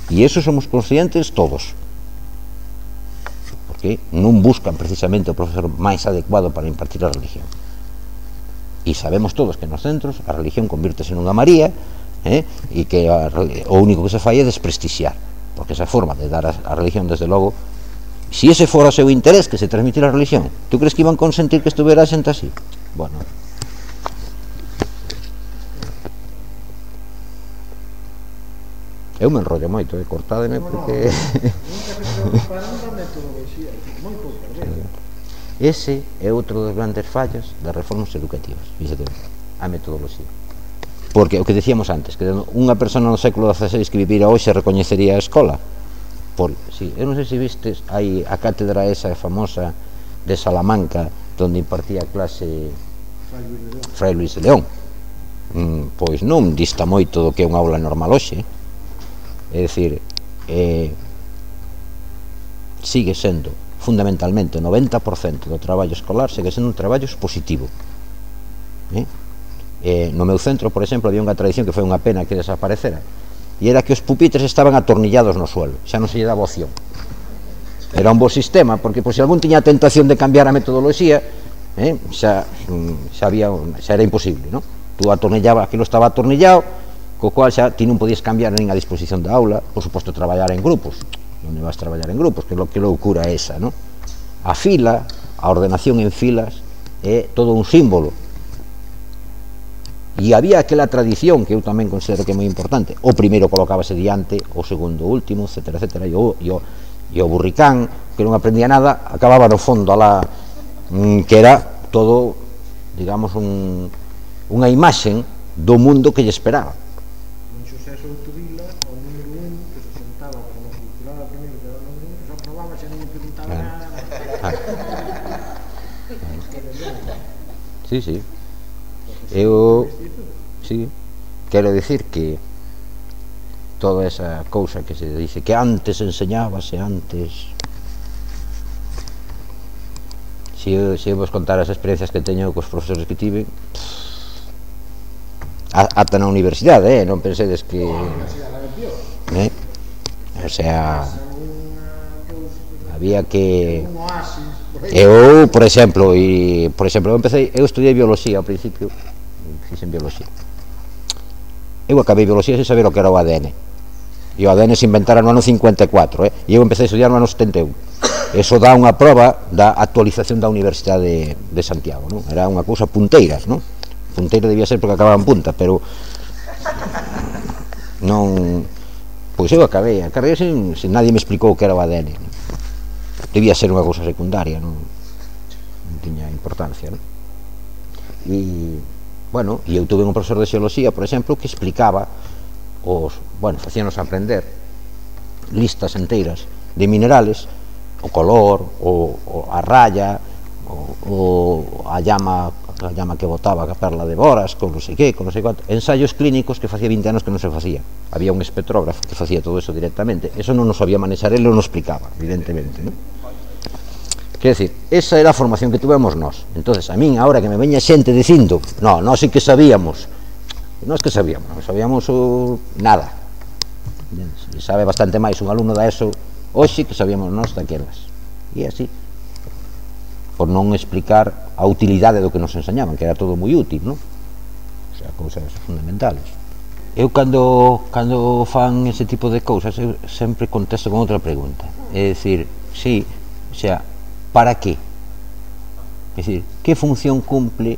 Speaker 2: E iso somos conscientes todos, porque non buscan precisamente o profesor máis adecuado para impartir a religión. E sabemos todos que nos centros a religión convírtese nunha María, eh? E que a, o único que se fai é desprestixiar, porque esa forma de dar a, a religión, desde logo, si ese fora o seu interés que se transmitira a religión, tú crees que iban consentir que estuvera a xente así? Bueno, eu me enrollo moito, eh? Cortádeme porque... Ese é outro dos grandes fallos das reformas educativas, fíxate, a metodoloxía. Porque o que decíamos antes, que unha persona no século dieciséis que vivira hoxe recoñecería a escola. Por, sí, eu non sei se vistes, hai a cátedra esa famosa de Salamanca, donde impartía clase Fray Luis de León. Mm, pois non dista moito do que é unha aula normal hoxe. É dicir, eh, sigue sendo fundamentalmente o noventa por cento do traballo escolar segue sendo un traballo expositivo. Eh? Eh, no meu centro, por exemplo, había unha tradición que foi unha pena que desaparecera, e era que os pupitres estaban atornillados no suelo, xa non se lle daba opción. Era un bo sistema, porque pois, se algún tiña a tentación de cambiar a metodoloxía, eh, xa, xa, había, xa era imposible, non? Tú atornillaba, aquilo estaba atornillado, co cual xa ti non podías cambiar nin a disposición da aula, por suposto traballar en grupos, onde vas traballar en grupos, que, lo, que loucura é esa, non? A fila, a ordenación en filas, é todo un símbolo. E había aquela tradición que eu tamén considero que é moi importante. O primeiro colocábase diante, o segundo último, etcétera, etcétera, e o, e o, e o burricán, que non aprendía nada, acababa no fondo alá, que era todo, digamos, un, unha imaxen do mundo que lle esperaba.
Speaker 3: Un Xosé Souto Vila, o número un, que se sentaba como circulaba primeiro, que era o número un, que só probaba, xa non lle preguntaba nada.
Speaker 2: Sí, sí. Eu, sí, quero dicir que toda esa cousa que se dice que antes enseñábase, antes... Se eu, se eu vos contar as experiencias que teño cos profesores que tive, ata na universidade, eh? Non pensedes que... Eh? O sea, había que... Eu, por exemplo, e, por exemplo, eu empecé, eu estudiei biología ao principio, fixen biología. Eu acabei biología sen saber o que era o A D N. E o A D N se inventara no ano cincuenta e catro, eh? E eu empecé a estudiar no ano setenta e un. Eso dá unha proba da actualización da Universidade de, de Santiago, non? Era unha cousa punteiras, non? Punteira debía ser porque acababa en punta, pero non... Pois eu acabei, acabei sen, sen nadie me explicou o que era o A D N, non? Debía ser unha cousa secundaria, non, non tiña importancia, non? E, bueno, e eu tuve un profesor de xeoloxía, por exemplo, que explicaba os, bueno, facíanos aprender listas enteiras de minerales, o color, o, o a raya, o, o a llama, a llama que botaba a perla de Boras, con non sei que, con non sei quanto, ensaios clínicos que facía vinte anos que non se facía. Había un espectrógrafo que facía todo eso directamente, eso non nos sabía manexar, ele non nos explicaba, evidentemente, non? Quer decir, esa era a formación que tuvemos nós. Entonces, a min, ahora que me veña xente dicindo, no, nós sí que sabíamos, nós que sabíamos, non sabíamos o... nada. E sabe bastante máis un alumno da ESO hoxe que sabíamos nós daquelas. E así, por non explicar a utilidade do que nos enseñaban, que era todo moi útil, non? O sea, cousas fundamentales. Eu, cando, cando fan ese tipo de cousas, eu sempre contesto con outra pregunta. É dicir, sí, o sea, para qué? É dicir, que función cumple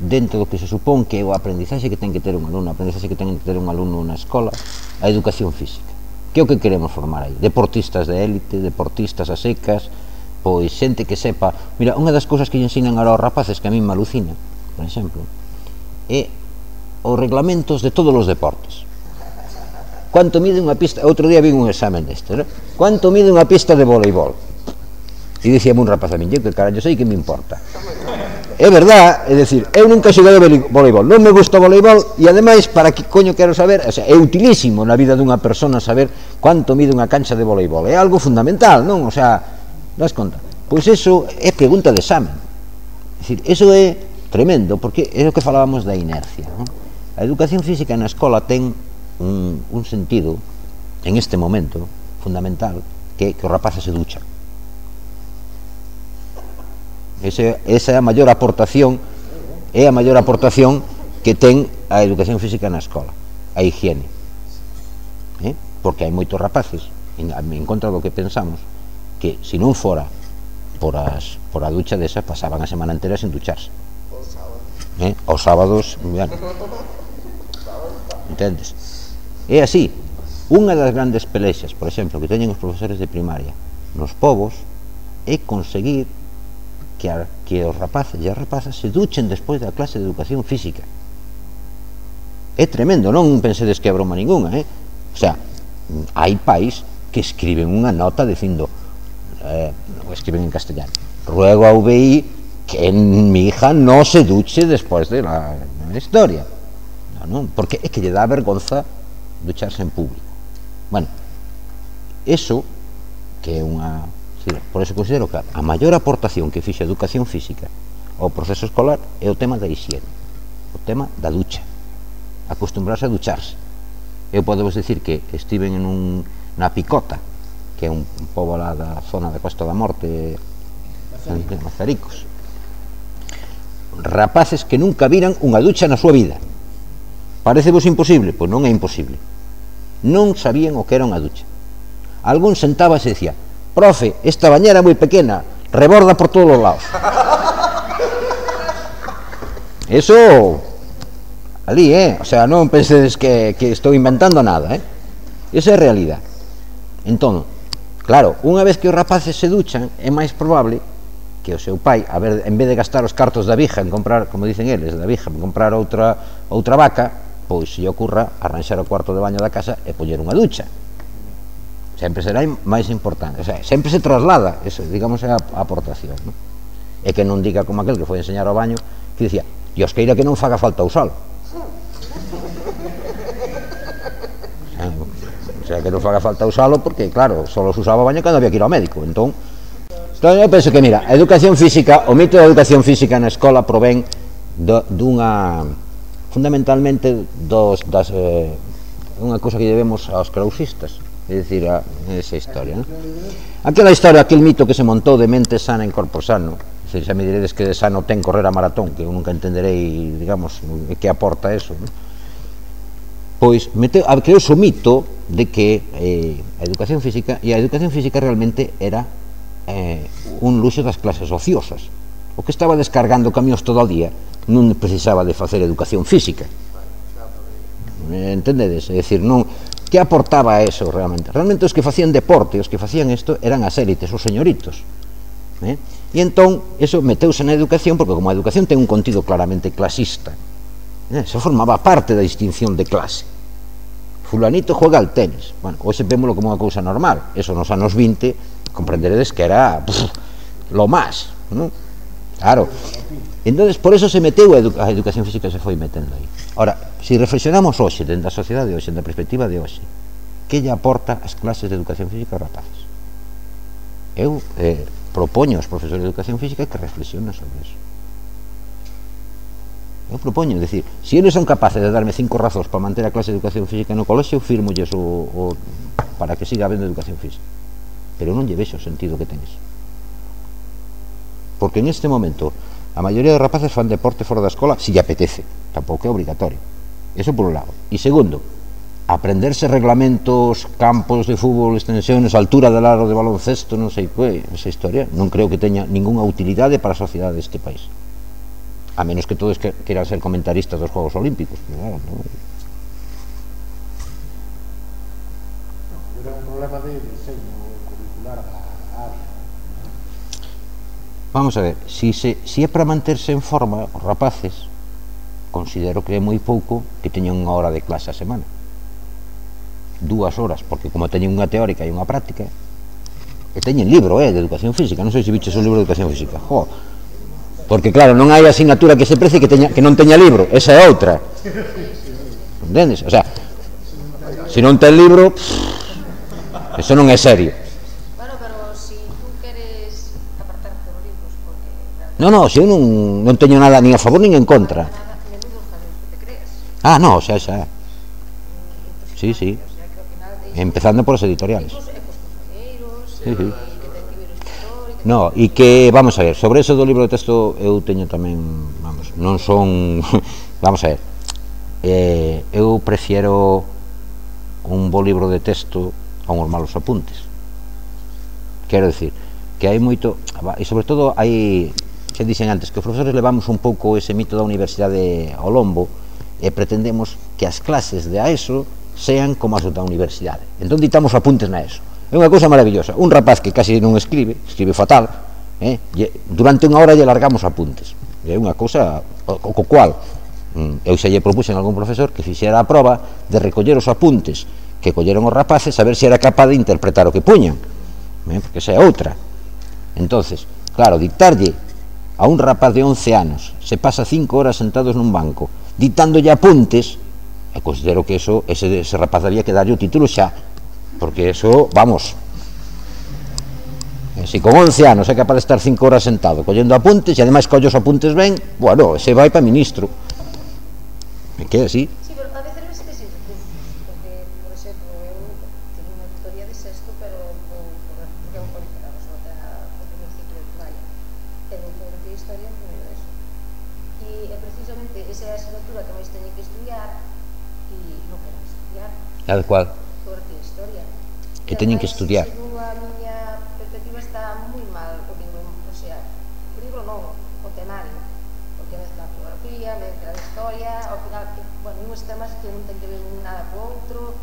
Speaker 2: dentro do que se supón que é o aprendizaxe que ten que ter un alumno, a aprendizaxe que ten que ter un alumno na escola, a educación física? Que é o que queremos formar aí? Deportistas de élite, deportistas a secas, pois xente que sepa... Mira, unha das cousas que lle ensinan aos rapaces que a mí me alucina, por exemplo, é os reglamentos de todos os deportes. Quanto mide unha pista... Outro día vi un examen deste, non? Quanto mide unha pista de voleibol? E dicíame un rapaz a min, eu que carallo sei que me importa. É verdad, é dicir, eu nunca xogado voleibol, non me gusta o voleibol e ademais, para que coño quero saber, o sea, é utilísimo na vida dunha persona saber quanto mide unha cancha de voleibol, é algo fundamental, non? O sea, das conta? Pois eso é pregunta de examen. É dicir, eso é tremendo, porque é o que falábamos da inercia, non? A educación física na escola ten un, un sentido, en este momento, fundamental, que, que os rapaces se duchan. Ese, esa é a maior aportación, é a maior aportación que ten a educación física na escola, a higiene. Eh? Porque hai moitos rapaces, en, en contra do que pensamos, que se non fora por, as, por a ducha desa, pasaban a semana entera sen ducharse. Eh? Os sábados, bueno, entendes? É así. Unha das grandes pelexas, por exemplo, que teñen os profesores de primaria nos povos é conseguir que, a, que os rapaces e as rapazas se duchen despois da clase de educación física. É tremendo, non pensedes que é broma ninguna, eh? O sea, hai pais que escriben unha nota dicindo, eh, escriben en castellano, ruego a U V I que mi hija no se duche despois de la, de la historia. No, non, porque é que lle dá vergonza ducharse en público. Bueno, eso que é unha... Por eso considero que a maior aportación que fixe a educación física ao proceso escolar é o tema da higiene, o tema da ducha, acostumbrarse a ducharse. eu podemos decir que estiven en un, na Picota, que é un, un pobo lá da zona da Costa da Morte, en Mazaricos, rapaces que nunca viran unha ducha na súa vida. Parecevos imposible? Pois non é imposible. Non sabían o que era unha ducha. Algún sentábase e dicía: profe, esta bañera é moi pequena, reborda por todos os lados. Eso ali, eh? O sea, non pensedes que, que estou inventando nada, eh? Esa é a realidade. Entón, claro, unha vez que os rapaces se duchan, é máis probable que o seu pai, a ver, en vez de gastar os cartos da vija en comprar, como dicen eles, da vija, en comprar outra outra vaca, pois se lle ocurra arranxar o cuarto de baño da casa e poñer unha ducha. Sempre será máis importante, o sea, sempre se traslada, eso, digamos, é a, a aportación, ¿no? E que non diga como aquel que foi enseñar ao baño, que dicía: Dios queira que non faga falta usalo. O sea, que non faga falta usalo porque, claro, só se usaba o baño cando había que ir ao médico. Entón, entón eu penso que, mira, a educación física, o mito da educación física na escola provén do, dunha, fundamentalmente, dos, das, eh, unha cousa que debemos aos krausistas, é dicir, a esa historia, ¿no? Aquela historia, aquel mito que se montou de mente sana en corpo sano. Se xa me diredes que de sano ten correr a maratón, que eu nunca entenderei, digamos, que aporta eso, ¿no? Pois meteu, creouse o mito de que eh, a educación física, e a educación física realmente era eh, un luxo das clases ociosas. O que estaba descargando camións todo o día non precisaba de facer educación física. Entendedes? É dicir, non, que aportaba a eso realmente? Realmente os que facían deporte, os que facían isto, eran as élites, os señoritos. Eh? E entón, eso meteuse na educación, porque como a educación ten un contido claramente clasista, eh? se formaba parte da distinción de clase. Fulanito juega al tenis. Bueno, hoxe vémoslo como unha cousa normal. Eso nos anos vinte, comprenderedes que era pff, lo más, ¿no? Claro. Entonces, por eso se meteu a, edu a educación física, se foi metendo aí. Ahora, se si reflexionamos hoxe, dentro da sociedade de hoxe, da perspectiva de hoxe, que lle aporta as clases de educación física aos rapaces? Eu eh, propoño aos profesores de educación física que reflexionen sobre eso. Eu propoño, é dicir, se eles son capaces de darme cinco razóns para manter a clase de educación física no colexio, firmolles o, o, para que siga habendo educación física. Pero non lle vexo o sentido que ten eso. Porque en este momento a maioría dos rapaces fan deporte fora da escola se lle apetece, tampouco é obrigatorio. Eso por un lado. E segundo, aprenderse reglamentos, campos de fútbol, extensiones, altura del aro de baloncesto, non sei que, esa historia, non creo que teña ninguna utilidade para a sociedade deste país. A menos que todos que, quieran ser comentaristas dos Juegos Olímpicos. Claro, ¿no?
Speaker 3: Era un problema de diseño curricular a área.
Speaker 2: Vamos a ver, si, se, si é para manterse en forma, os rapaces, considero que é moi pouco que teñan unha hora de clase a semana. Dúas horas, porque como teñen unha teórica e unha práctica, e teñen libro, eh, de educación física, non sei se biches o libro de educación física, jo, porque claro, non hai asignatura que se precie que, teña, que non teña libro, esa é outra, entendes? O sea, se non ten libro, pff, eso non é serio.
Speaker 5: Bueno, pero si tú queres apartarte dos libros, porque...
Speaker 2: No, no, se eu non, non teño nada ni a favor nin en contra.
Speaker 5: Menudos jaleos que te creas.
Speaker 2: Ah, no, xa, xa. Sí, sí. Empezando por os editoriales. Sí, sí. No, e que, vamos a ver, sobre eso do libro de texto eu teño tamén, vamos, non son, vamos a ver, eh, eu prefiero un bo libro de texto a uns malos apuntes. Quero dicir, que hai moito, e sobre todo hai, xa dixen antes, que os profesores levamos un pouco ese mito da universidade ao lombo e pretendemos que as clases de A E S O sean como as da universidade. Entón ditamos apuntes na E S O. É unha cousa maravillosa. Un rapaz que casi non escribe, escribe fatal, eh, durante unha hora lle largamos apuntes. É unha cousa o, o cual eu xa lle propuxen a algún profesor que fixera a proba de recoller os apuntes que colleron os rapaces a ver se era capaz de interpretar o que puñan, eh, porque esa é outra. Entonces, claro, dictarlle a un rapaz de once anos, se pasa cinco horas sentados nun banco dictándolle apuntes, eu considero que eso, ese, ese rapaz había que darlle o título xa, porque eso, vamos, se con once anos é capaz de estar cinco horas sentado collendo apuntes e ademais colle os apuntes ben, bueno, se vai para ministro. É que é así.
Speaker 5: Sí, pero a veces non se te sirve, porque é precisamente esa é a asignatura que máis teñen que estudiar e non quero estudiar.
Speaker 2: A de cual?
Speaker 5: Porque historia.
Speaker 2: Que teñen que estudiar.
Speaker 5: Según a miña perspectiva está moi mal o libro, o sea, o libro non, o temario, porque mezcla geografía, mezcla historia, ao final, bueno, uns temas que non ten que ver nada co outro,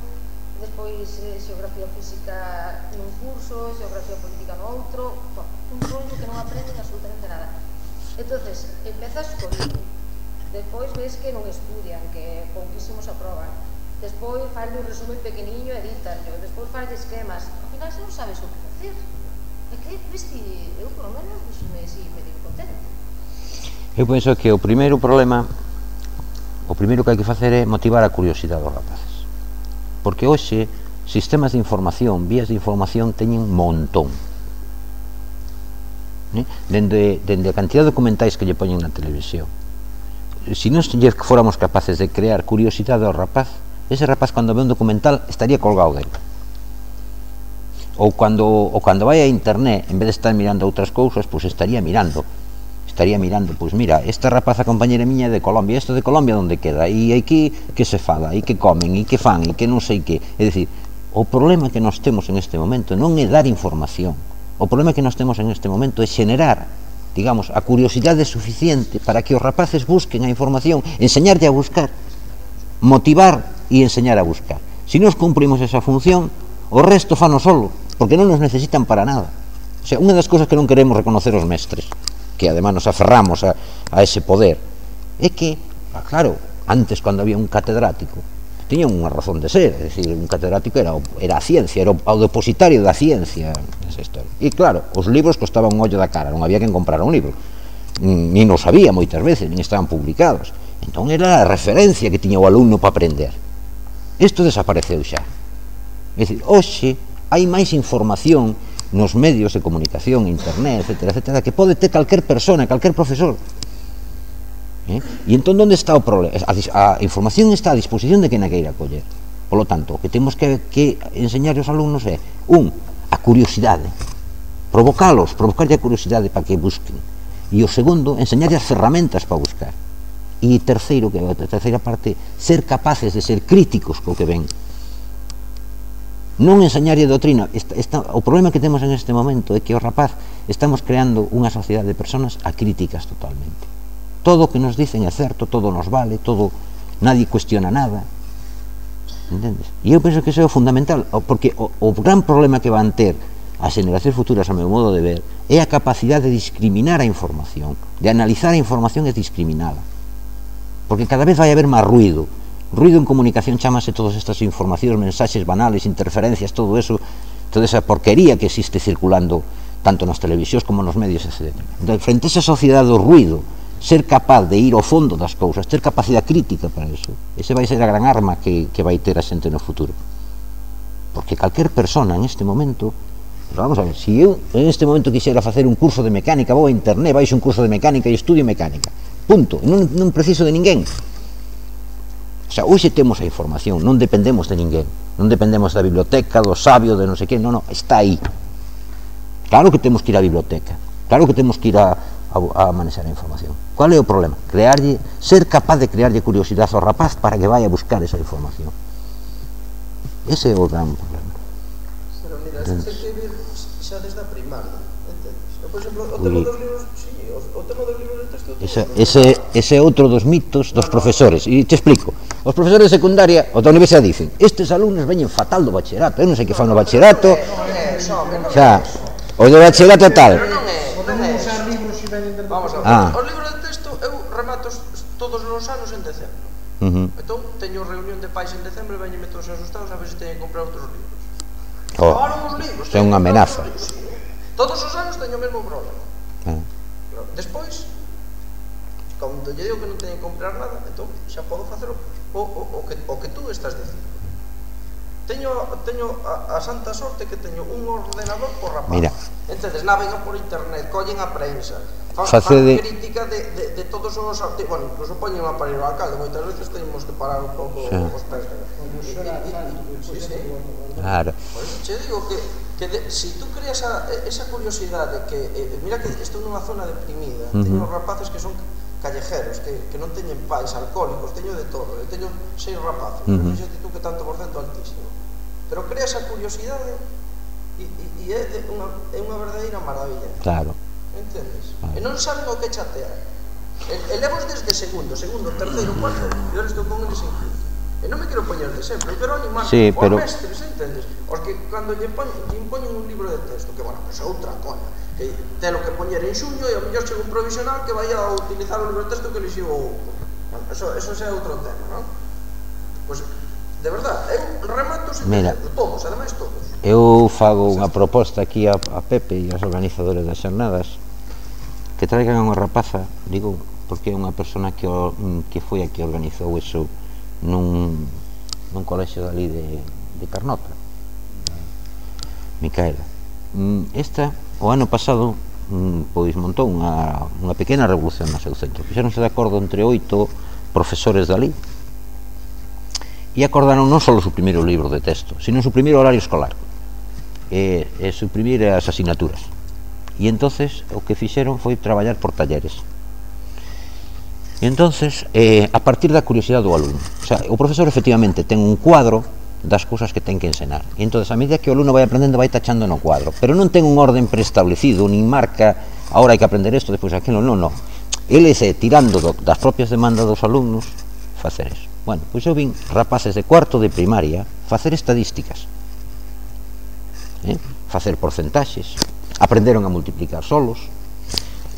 Speaker 5: despois eh, xeografía física nun curso, xeografía política no outro, bueno, un rollo que non aprenden absolutamente nada. Entonces, empezas co libro, despois ves que non estudian, que pouquísimos aproban, despois faz un resumen pequeniño e editanlo, despois faz esquemas, ao final xa non sabes o que facer. É que, viste, eu polo menos me, si, me digo contente.
Speaker 2: Eu penso que o primeiro problema, o primeiro que hai que facer é motivar a curiosidade dos rapaces. Porque hoxe, sistemas de información, vías de información, teñen un montón. ¿Eh? Dende, dende a cantidad de documentais que lle poñen na televisión. Se non fóramos capaces de crear curiosidade ao rapaz, ese rapaz cando ve un documental estaría colgado dele. Ou cando, ou cando vai a internet, en vez de estar mirando outras cousas, pois estaría mirando. Estaría mirando, pois mira, esta rapaza compañera miña é de Colombia, isto de Colombia onde queda, e aquí que se fala, e que comen, e que fan, e que non sei que. É dicir, o problema que nós temos en este momento non é dar información, o problema que nós temos en este momento é xenerar, digamos, a curiosidade suficiente para que os rapaces busquen a información, enseñarlle a buscar, motivar e enseñar a buscar. Se nos cumprimos esa función, o resto fano solo, porque non nos necesitan para nada. O sea, unha das cousas que non queremos reconocer os mestres, que además nos aferramos a, a ese poder, é que, claro, antes cando había un catedrático, tiña unha razón de ser, é dicir, un catedrático era, era a ciencia, era o, o depositario da ciencia nesa historia. E claro, os libros costaban un ollo da cara, non había quen comprar un libro, nin non sabía moitas veces, nin estaban publicados. Entón era a referencia que tiña o alumno para aprender. Isto desapareceu xa. É dicir, hoxe hai máis información nos medios de comunicación, internet, etcétera, etcétera, que pode ter calquer persona, calquer profesor. ¿Eh? E entón, onde está o problema? A, a información está a disposición de quen a queira coller. Por lo tanto, o que temos que, que enseñar aos alumnos é, un, a curiosidade, provocalos, provocarlle a curiosidade para que busquen. E o segundo, enseñarlle as ferramentas para buscar. E terceiro, que é a terceira parte, ser capaces de ser críticos co que ven. Non enseñarlle doutrina. Esta, esta, o problema que temos en este momento é que o rapaz estamos creando unha sociedade de personas acríticas totalmente. Todo o que nos dicen é certo, todo nos vale, todo, nadie cuestiona nada. Entendes? E eu penso que iso é o fundamental, porque o, o gran problema que van ter as generacións futuras, a meu modo de ver, é a capacidade de discriminar a información, de analizar a información e discriminala. Porque cada vez vai haber máis ruido. Ruido en comunicación chamase todas estas informacións, mensaxes banales, interferencias, todo eso, toda esa porquería que existe circulando tanto nas televisións como nos medios, etcétera. Frente a esa sociedade do ruido, ser capaz de ir ao fondo das cousas, ter capacidade crítica para eso, ese vai ser a gran arma que, que vai ter a xente no futuro. Porque calquer persona en este momento, vamos a ver, se eu en este momento quixera facer un curso de mecánica, vou a internet, baixo un curso de mecánica e estudio mecánica, punto, non, non preciso de ninguén. O sea, hoxe temos a información, non dependemos de ninguén, non dependemos da biblioteca, do sabio, de non sei que, non, non, está aí. Claro que temos que ir á biblioteca, claro que temos que ir a, a, a manexar a información. Qual é o problema? Crearlle, ser capaz de crearlle curiosidade ao rapaz para que vai a buscar esa información. Ese é o gran problema.
Speaker 4: Pero mira, isto hai que vir xa desde a primaria, entendes? Eu, por exemplo, o tema dos libros, sí, o tema dos libros de texto...
Speaker 2: Ese, ese, ese é outro dos mitos dos profesores, e te explico. Os profesores de secundaria ou da universidade dicen, estes alumnos veñen fatal do bachillerato, eu non sei que fan no bachillerato, xa, o do bachillerato tal.
Speaker 3: Podemos usar libros e veñen dentro.
Speaker 4: Vamos a ver,
Speaker 2: Ah.
Speaker 4: os libros de texto eu remato todos os anos en decembro.
Speaker 2: Uh -huh.
Speaker 4: Entón, teño reunión de pais en decembro e veñenme todos asustados a ver se teñen que comprar outros libros.
Speaker 2: Oh,
Speaker 4: Acabaron os libros.
Speaker 2: é unha amenaza.
Speaker 4: Sí. Todos os anos teño o mesmo problema.
Speaker 2: Ah.
Speaker 4: Despois, cando lle digo que non teñen que comprar nada, entón xa podo facer o, o, o, o, que, o que tú estás dicindo. Teño, teño a, a santa sorte que teño un ordenador por rapaz.
Speaker 2: Mira.
Speaker 4: Entonces navegan por internet, collen a prensa, fan,
Speaker 2: Facede...
Speaker 4: fan crítica de, de, de todos os artigos, bueno, incluso poñen a parir o alcalde, moitas veces teñemos que parar un pouco
Speaker 2: sí.
Speaker 4: os pés. Sí, sí.
Speaker 2: Claro.
Speaker 4: Por eso che digo que, que de, si tú creas a, esa curiosidade que, eh, mira que estou nunha zona deprimida, uh -huh. teño rapaces que son callejeros, que, que non teñen pais, alcohólicos, teño de todo. Eu teño seis rapaces,
Speaker 2: Uh -huh.
Speaker 4: pero fíxate tú que tanto por cento altísimo. Pero crea esa curiosidade e, e, e é, unha, é unha verdadeira maravilla.
Speaker 2: Claro.
Speaker 4: Entendes?
Speaker 2: Vale.
Speaker 4: E non saben o que chatear. E, e levos desde segundo, segundo, terceiro, cuarto, e ahora estou con eles en quinto. E non me quero poñer de sempre, pero animar
Speaker 2: sí,
Speaker 4: os
Speaker 2: pero...
Speaker 4: mestres, entendes? Os que cando lle, pon, lle impoñen un libro de texto, que, bueno, pues é outra coña, que ten o que poñer en xuño e ao mellor chega un provisional que vai a utilizar o libro de texto que elixiu o outro. Bueno, eso, eso é outro tema, non? Pois, pues, de verdad, eu remato sen
Speaker 2: Mira,
Speaker 4: texto, todos, ademais todos.
Speaker 2: Eu fago unha proposta aquí a, a Pepe e aos organizadores das xornadas que traigan unha rapaza, digo, porque é unha persona que, o, que foi a que organizou eso nun, nun colexio dali de, de Carnota, Micaela. Esta, o ano pasado, pois montou unha, unha pequena revolución no seu centro. Fixeronse de acordo entre oito profesores dali e acordaron non só suprimir o libro de texto, sino suprimir o horario escolar e, e suprimir as asignaturas. E entonces o que fixeron foi traballar por talleres. E entonces, eh, a partir da curiosidade do alumno, o sea, o profesor efectivamente ten un cuadro das cousas que ten que ensenar, e entonces a medida que o alumno vai aprendendo vai tachando no cuadro, pero non ten un orden preestablecido, nin marca, ahora hai que aprender isto, despois aquilo, non, non. Ele é tirando do, das propias demandas dos alumnos facer eso. Bueno, pois eu vin rapaces de cuarto de primaria facer estadísticas, eh? facer porcentaxes, aprenderon a multiplicar solos,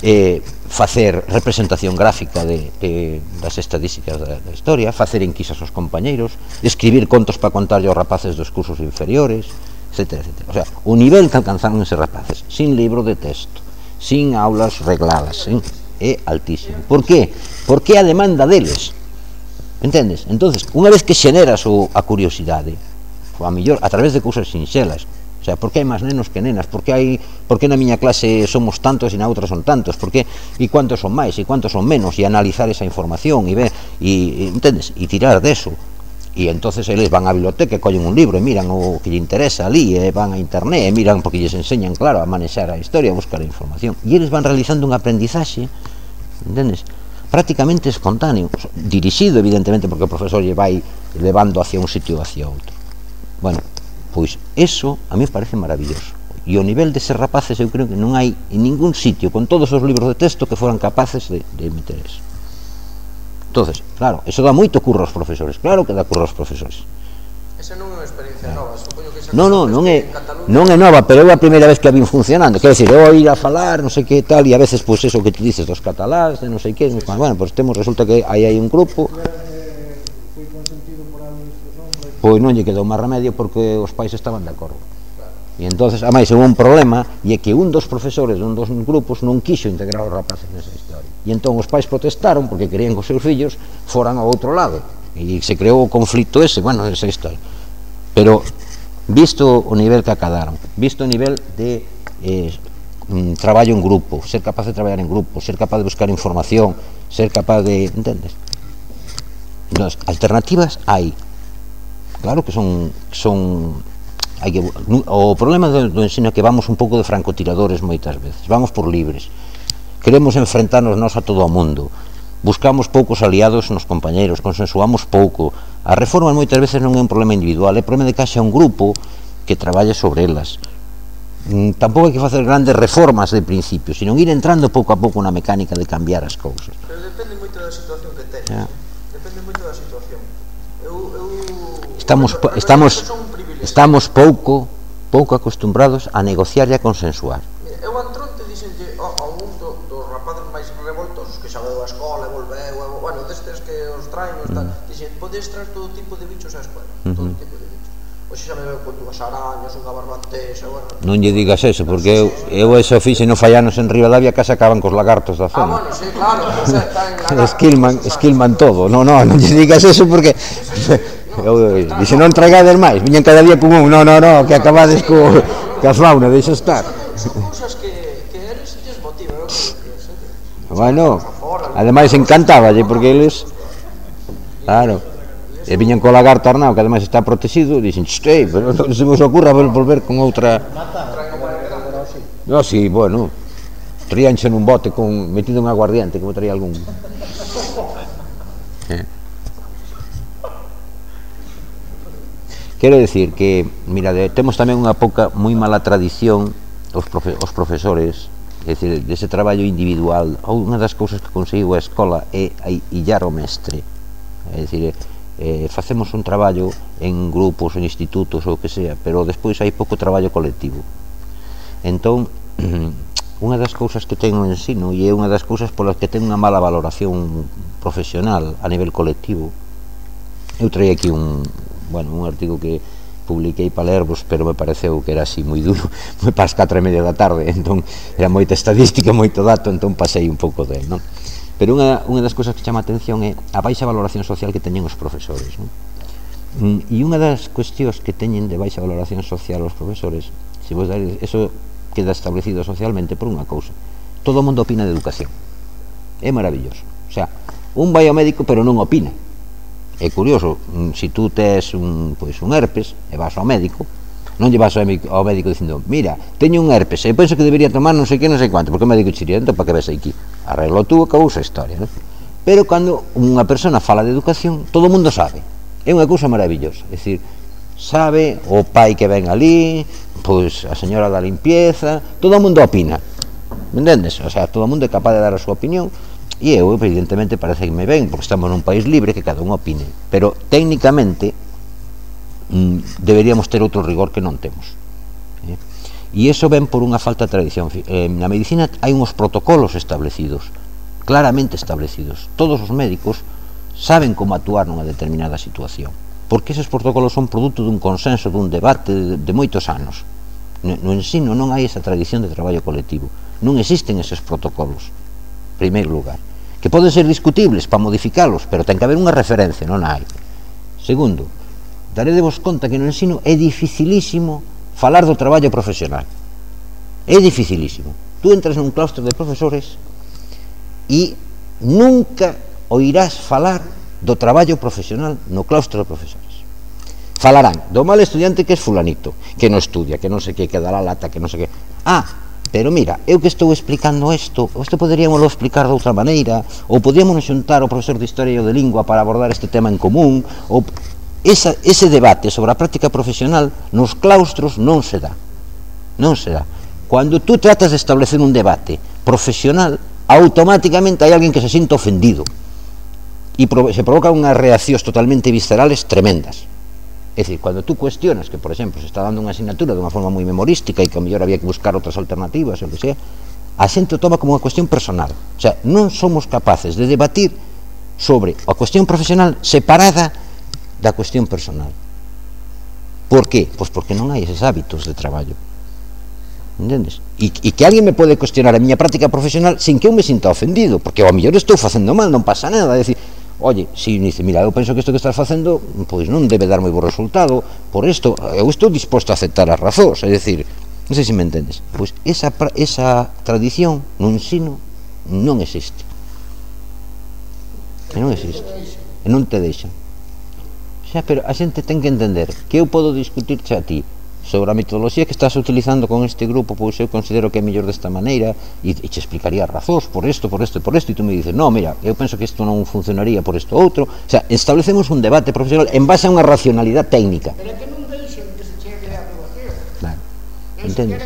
Speaker 2: eh, facer representación gráfica de, de, das estadísticas da, da historia, facer enquisas aos compañeiros, escribir contos para contarlle aos rapaces dos cursos inferiores, etcétera, etcétera. O sea, o nivel que alcanzaron eses rapaces, sin libro de texto, sin aulas regladas, ¿eh? É altísimo. Por qué? Porque a demanda deles, entendes? Entonces, unha vez que xeneras o, a curiosidade, a mellor a través de cousas sinxelas, o sea, por que hai máis nenos que nenas? Por que hai, por que na miña clase somos tantos e na outra son tantos? Por que, e cuántos son máis e cuántos son menos? E analizar esa información e ver, e, e entendes? E tirar deso. E entonces eles van á biblioteca e collen un libro e miran o que lle interesa ali, e van a internet e miran porque lles enseñan, claro, a manexar a historia, a buscar a información. E eles van realizando un aprendizaxe, entendes? Prácticamente espontáneo, dirixido evidentemente porque o profesor lle vai levando hacia un sitio ou hacia outro. Bueno, pois eso a mí me parece maravilloso, e o nivel deses rapaces eu creo que non hai en ningún sitio con todos os libros de texto que foran capaces de, de meter eso. Entonces, claro, eso dá moito curro aos profesores, claro que dá curro aos profesores.
Speaker 4: Esa non é unha experiencia nova, supoño que esa
Speaker 2: non, non, non é, non é nova, pero é a primeira vez que a vin funcionando, quero decir, eu ir a falar, non sei que tal, e a veces, pois, eso que tú dices dos cataláns, de non sei que, bueno, pois temos, resulta que aí hai un grupo, pois non lle quedou máis remedio porque os pais estaban de acordo. E entonces, ademais, houve un problema, e é que un dos profesores dun dos grupos non quixo integrar os rapaces nesa historia. E entón os pais protestaron porque querían que os seus fillos foran ao outro lado. E se creou o conflito ese, bueno, esa historia. Pero, visto o nivel que acadaron, visto o nivel de eh, un traballo en grupo, ser capaz de traballar en grupo, ser capaz de buscar información, ser capaz de... entendes? Entón, alternativas hai. Claro que son... son hai que, o problema do, do ensino é que vamos un pouco de francotiradores moitas veces, vamos por libres, queremos enfrentarnos nós a todo o mundo, buscamos poucos aliados nos compañeros, consensuamos pouco. A reforma moitas veces non é un problema individual, é problema de que haxa un grupo que traballe sobre elas. Mm, tampouco hai que facer grandes reformas de principio, sino ir entrando pouco a pouco na mecánica de cambiar as cousas.
Speaker 4: Pero depende moito da situación que teñes, yeah. Depende moito da situación. Eu, eu...
Speaker 2: Estamos,
Speaker 4: Pero,
Speaker 2: estamos, estamos pouco, pouco acostumbrados a negociar e a consensuar.
Speaker 4: Mira, eu antronte dixenlle a, a un do, dos rapaces máis revoltosos que xa veu a escola e volveu, e, bueno, destes que os traen, os tal, mm. dixen, podes traer todo tipo de bichos á escola, mm -hmm. todo tipo de bichos. Oxe xa me veu con dúas arañas, unha barbantesa, bueno...
Speaker 2: Non lle digas eso, porque eu, eu eso fixe no fallanos en Rivadavia que se acaban cos lagartos da zona.
Speaker 4: Ah, bueno, sí, claro, o sea, está en lagartos.
Speaker 2: Esquilman, esquilman todo, non, non, non lle digas eso porque... Eu dixe, non traigades máis, viñan cada día con un, non, non, non, que acabades co, ca fauna, deixa estar.
Speaker 4: Son cousas que, que eles lles motivan, eu creo que...
Speaker 2: Bueno, ademais encantáballe, porque eles, claro, e viñan co lagarto Arnao, que ademais está protegido, e dixen, ei, pero non se vos ocurra volver con outra... No, si, bueno, tríanxe nun bote con, metido un aguardiente, como traía algún... Eh. Quero decir que, mira, temos tamén unha pouca moi mala tradición os, profe, os profesores, é dicir, dese traballo individual. Unha das cousas que conseguiu a escola é illar o mestre, é dicir, eh, facemos un traballo en grupos, en institutos ou o que sea, pero despois hai pouco traballo colectivo. Entón, unha das cousas que ten o ensino, e é unha das cousas polas que ten unha mala valoración profesional a nivel colectivo, eu traí aquí un bueno, un artigo que publiquei para lervos, pero me pareceu que era así moi duro, moi para as catro e media da tarde, entón era moita estadística, moito dato, entón pasei un pouco de, non? Pero unha, unha das cousas que chama a atención é a baixa valoración social que teñen os profesores, non? E unha das cuestións que teñen de baixa valoración social os profesores, se vos dades, eso queda establecido socialmente por unha cousa: todo o mundo opina de educación, é maravilloso, o sea, un vai ao médico pero non opina. É curioso, se tú tes un, pois, un herpes e vas ao médico, non lle vas ao médico dicindo, mira, teño un herpes e penso que debería tomar non sei que, non sei cuánto, porque o médico chiría, entón para que ves aquí, arreglo tú, acabou a historia, non? Pero cando unha persona fala de educación, todo o mundo sabe, é unha cousa maravillosa, é dicir, sabe o pai que ven ali, pois a señora da limpieza, todo o mundo opina, me entendes? O sea, todo o mundo é capaz de dar a súa opinión. E eu, evidentemente, parece que me ven, porque estamos nun país libre que cada un opine, pero técnicamente mmm, deberíamos ter outro rigor que non temos, eh? E iso ven por unha falta de tradición. Eh, na medicina hai uns protocolos establecidos, claramente establecidos. Todos os médicos saben como actuar nunha determinada situación, porque eses protocolos son produto dun consenso, dun debate de, de moitos anos. No, no ensino non hai esa tradición de traballo colectivo, non existen eses protocolos, en primeiro lugar, que poden ser discutibles para modificalos, pero ten que haber unha referencia, non hai. Segundo, daredevos conta que no ensino é dificilísimo falar do traballo profesional, é dificilísimo. Tú entras nun claustro de profesores e nunca oirás falar do traballo profesional no claustro de profesores. Falarán do mal estudiante que é fulanito, que non estudia, que non sei que, que dá la lata, que non sei que. Ah, pero mira, eu que estou explicando isto, isto poderíamoslo explicar de outra maneira, ou podíamos xuntar o profesor de Historia e o de Lingua para abordar este tema en común, ou esa, ese debate sobre a práctica profesional nos claustros non se dá, non se dá. Cando tú tratas de establecer un debate profesional, automáticamente hai alguén que se sinta ofendido, e se provocan unhas reaccións totalmente viscerales tremendas. É dicir, cando tú cuestionas que, por exemplo, se está dando unha asignatura de unha forma moi memorística e que a mellor había que buscar outras alternativas, ou que sea, a xente o toma como unha cuestión personal. O sea, non somos capaces de debatir sobre a cuestión profesional separada da cuestión personal. Por qué? Pois porque non hai eses hábitos de traballo. Entendes? E, e que alguén me pode cuestionar a miña práctica profesional sin que eu me sinta ofendido, porque ao mellor estou facendo mal, non pasa nada, é dicir, oye, si me dice, mira, eu penso que isto que estás facendo pois non debe dar moi bo resultado por isto, eu estou disposto a aceptar as razóns, é dicir, non sei se me entendes, pois esa, esa tradición no ensino non existe, e non existe, e non te deixa. O sea, pero a xente ten que entender que eu podo discutirche a ti sobre a metodoloxía que estás utilizando con este grupo, pois eu considero que é mellor desta maneira e, e te explicaría razóns por isto, por isto e por isto, e tú me dices, no, mira, eu penso que isto non funcionaría por isto outro. O sea, establecemos un debate profesional en base a unha racionalidade técnica.
Speaker 3: Pero é que non deixen que se chegue a aprobación.
Speaker 2: Claro,
Speaker 3: entendes?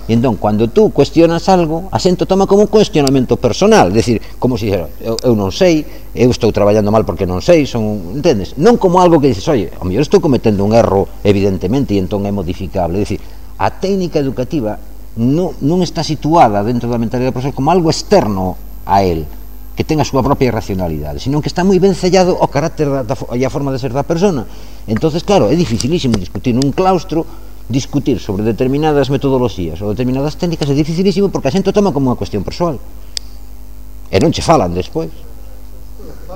Speaker 2: E entón, cando tú cuestionas algo, a xente toma como un cuestionamento personal, é dicir, como se dixera, eu, eu non sei, eu estou traballando mal porque non sei, son, entendes? Non como algo que dices, oye, ao mellor estou cometendo un erro, evidentemente, e entón é modificable. É dicir, a técnica educativa non, non está situada dentro da mentalidade do profesor como algo externo a él, que ten a súa propia racionalidade, sino que está moi ben sellado ao carácter da, da, e a forma de ser da persona. Entonces, claro, é dificilísimo discutir nun claustro, discutir sobre determinadas metodoloxías ou determinadas técnicas, é dificilísimo porque a xente o toma como unha cuestión persoal e non che falan despois.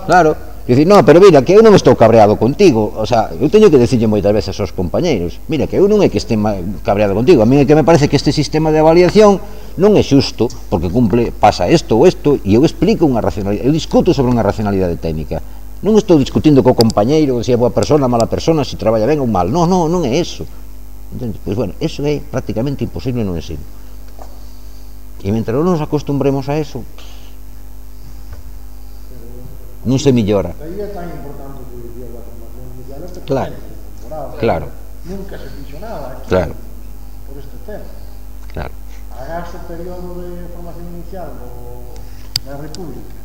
Speaker 2: Claro, dicir, no, pero mira, que eu non estou cabreado contigo, o sea, eu teño que decirlle moitas veces aos compañeiros, mira, que eu non é que este cabreado contigo, a mí é que me parece que este sistema de avaliación non é xusto, porque cumple, pasa isto ou isto, e eu explico unha racionalidade, eu discuto sobre unha racionalidade técnica, non estou discutindo co compañeiro se é boa persona, mala persona, se traballa ben ou mal, non, non, non é eso. Entonces, pois, bueno, eso é prácticamente imposible no ensino. E mentre non nos acostumbremos a eso, non se millora.
Speaker 3: Aí é tan importante que o día da formación inicial este
Speaker 2: Claro,
Speaker 3: temporada.
Speaker 2: claro.
Speaker 3: Nunca se fixo nada aquí
Speaker 2: Claro.
Speaker 3: por este tema.
Speaker 2: Claro.
Speaker 3: Agás o período de formación inicial do, da República,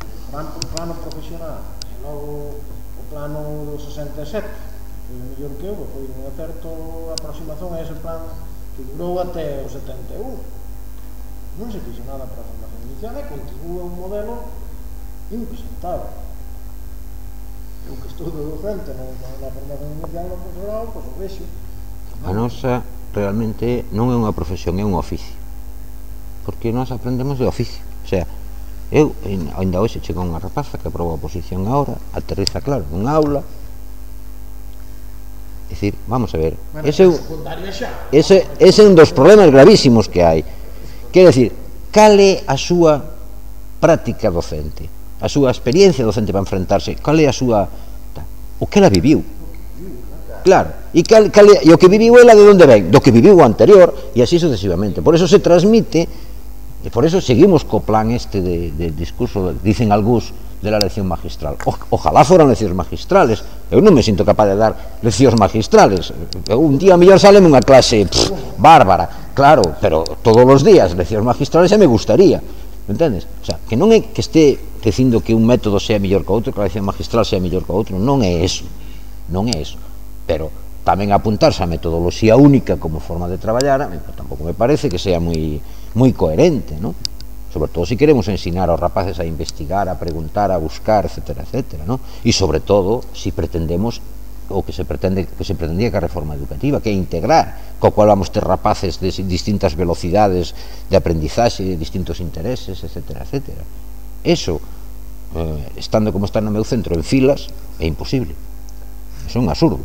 Speaker 3: o plano, o plano profesional, e logo o plano do sesenta e sete, foi o mellor que houve, foi unha certa aproximación a ese plan que durou até o setenta e un. Non se fixo nada para a formación inicial e continúa un modelo impresentable. Eu que estou de docente na, na formación inicial no profesorado, pois o vexo.
Speaker 2: A nosa realmente non é unha profesión, é un oficio, porque nós aprendemos de oficio. O sea, eu ainda hoxe chegou unha rapaza que aprobou a oposición agora, aterriza claro nunha aula. É dicir, vamos a ver,
Speaker 3: Bueno,
Speaker 2: ese,
Speaker 3: secundaria xa.
Speaker 2: ese, ese é un dos problemas gravísimos que hai. Quero dicir, cal é a súa práctica docente, a súa experiencia docente para enfrentarse, cal é a súa... o que ela viviu. Claro, e, cal, cal, e o que viviu ela de onde ven? Do que viviu o anterior, e así sucesivamente. Por eso se transmite, e por eso seguimos co plan este de, de discurso, dicen algúns, de la lección magistral. O, ojalá foran leccións magistrales. Eu non me sinto capaz de dar leccións magistrales. Eu, un día mellor sale unha clase pff, bárbara, claro, pero todos os días leccións magistrales xa me gustaría, entendes? O sea, que non é que este dicindo que un método sea mellor que outro, que a lección magistral sea mellor que outro, non é eso, non é eso. Pero tamén apuntarse a metodoloxía única como forma de traballar, tampouco me parece que sea moi moi coherente, non? Sobre todo se si queremos ensinar aos rapaces a investigar, a preguntar, a buscar, etcétera, etcétera, non? E sobre todo, se si pretendemos o que se pretende que se pretendía que a reforma educativa, que é integrar, co cual vamos ter rapaces de distintas velocidades de aprendizaxe, de distintos intereses, etcétera, etcétera. Eso, eh, estando como está no meu centro en filas, é imposible. Eso é un absurdo.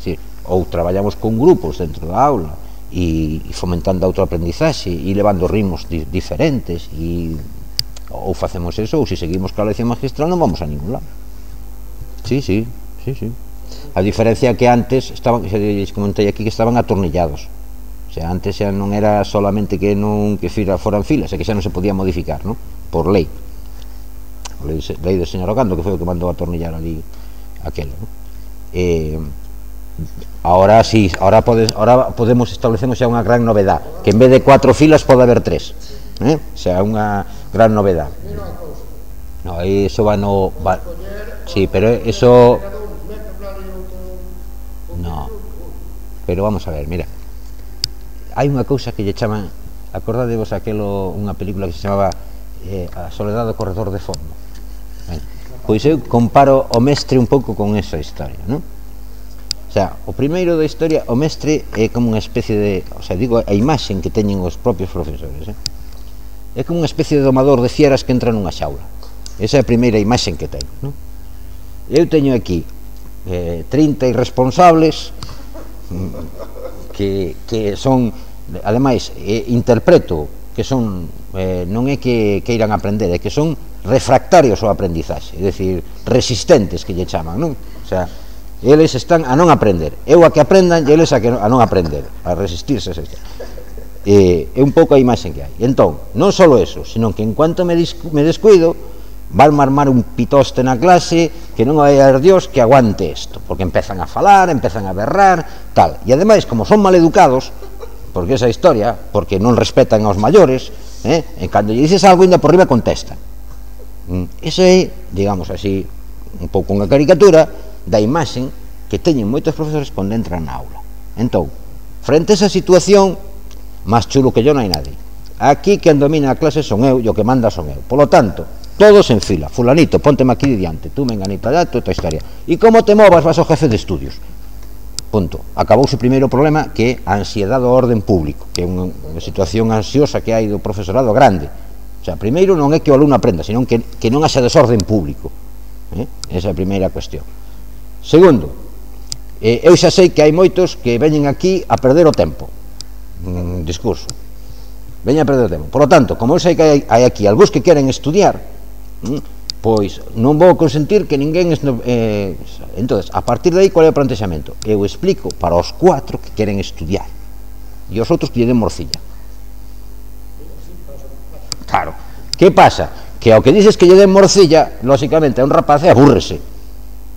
Speaker 2: Sí, ou traballamos con grupos dentro da aula e, e fomentando autoaprendizaxe e levando ritmos di, diferentes e ou facemos eso, ou se seguimos coa lección magistral non vamos a ningún lado. Sí, sí, sí, sí. A diferencia que antes estaban, xa lles comentei aquí, que estaban atornillados. O sea, antes xa non era solamente que non que fira foran filas, é que xa non se podía modificar, non? Por lei. A lei, lei do señor Ogando, que foi o que mandou atornillar ali aquelo, non? Eh, ahora sí, ahora, podes, ahora podemos establecemos xa unha gran novedad, que en vez de cuatro filas pode haber tres, eh? Xa unha gran novedad. No, eso va no va, sí, pero eso no. Pero vamos a ver, mira. Hai unha cousa que lle chaman, acordadevos aquelo, unha película que se chamaba eh, A soledad do corredor de fondo. Eh? Pois eu comparo o mestre un pouco con esa historia, non? O sea, o primeiro da historia, o mestre é como unha especie de, o sea, digo, a imaxen que teñen os propios profesores, eh? É como unha especie de domador de fieras que entra nunha xaula. Esa é a primeira imaxen que teño, non? Eu teño aquí eh, trinta irresponsables que, que son, ademais, eh, interpreto que son, eh, non é que, que irán aprender, é que son refractarios ao aprendizaxe, é dicir, resistentes que lle chaman, non? O sea, eles están a non aprender, eu a que aprendan e eles a, que, a non aprender, a resistirse a eh, é un pouco a imaxen que hai. Entón, non só eso, sino que en cuanto me, me descuido van armar un pitoste na clase que non vai haber Dios que aguante isto, porque empezan a falar, empezan a berrar, tal, e ademais, como son maleducados, porque esa historia, porque non respetan aos maiores, eh, e cando lle dices algo ainda por riba contestan. Esa é, digamos así, un pouco unha caricatura da imaxen que teñen moitos profesores cando entran na aula. Entón, frente a esa situación, máis chulo que yo non hai nadie. Aquí quen domina a clase son eu e o que manda son eu. Polo tanto, todos en fila. Fulanito, pónteme aquí diante, tú menganita allá, tú esta historia. E como te movas vas ao jefe de estudios. Punto. Acabouse o primeiro problema, que é a ansiedade do orden público, que é unha, unha situación ansiosa que hai do profesorado grande. O sea, primeiro non é que o alumno aprenda, senón que, que non haxa desorden público. Eh? Esa é a primeira cuestión. Segundo, eh, eu xa sei que hai moitos que veñen aquí a perder o tempo. Un discurso. Veñen a perder o tempo. Por lo tanto, como eu sei que hai, hai aquí algúns que queren estudiar, hm, pois non vou consentir que ninguén... Eh, entonces, a partir de aí, qual é o plantexamento? Eu explico para os cuatro que queren estudiar e os outros que lle den morcilla. Claro. Que pasa? que ao que dices que lle den morcilla, lóxicamente a un rapaz abúrrese.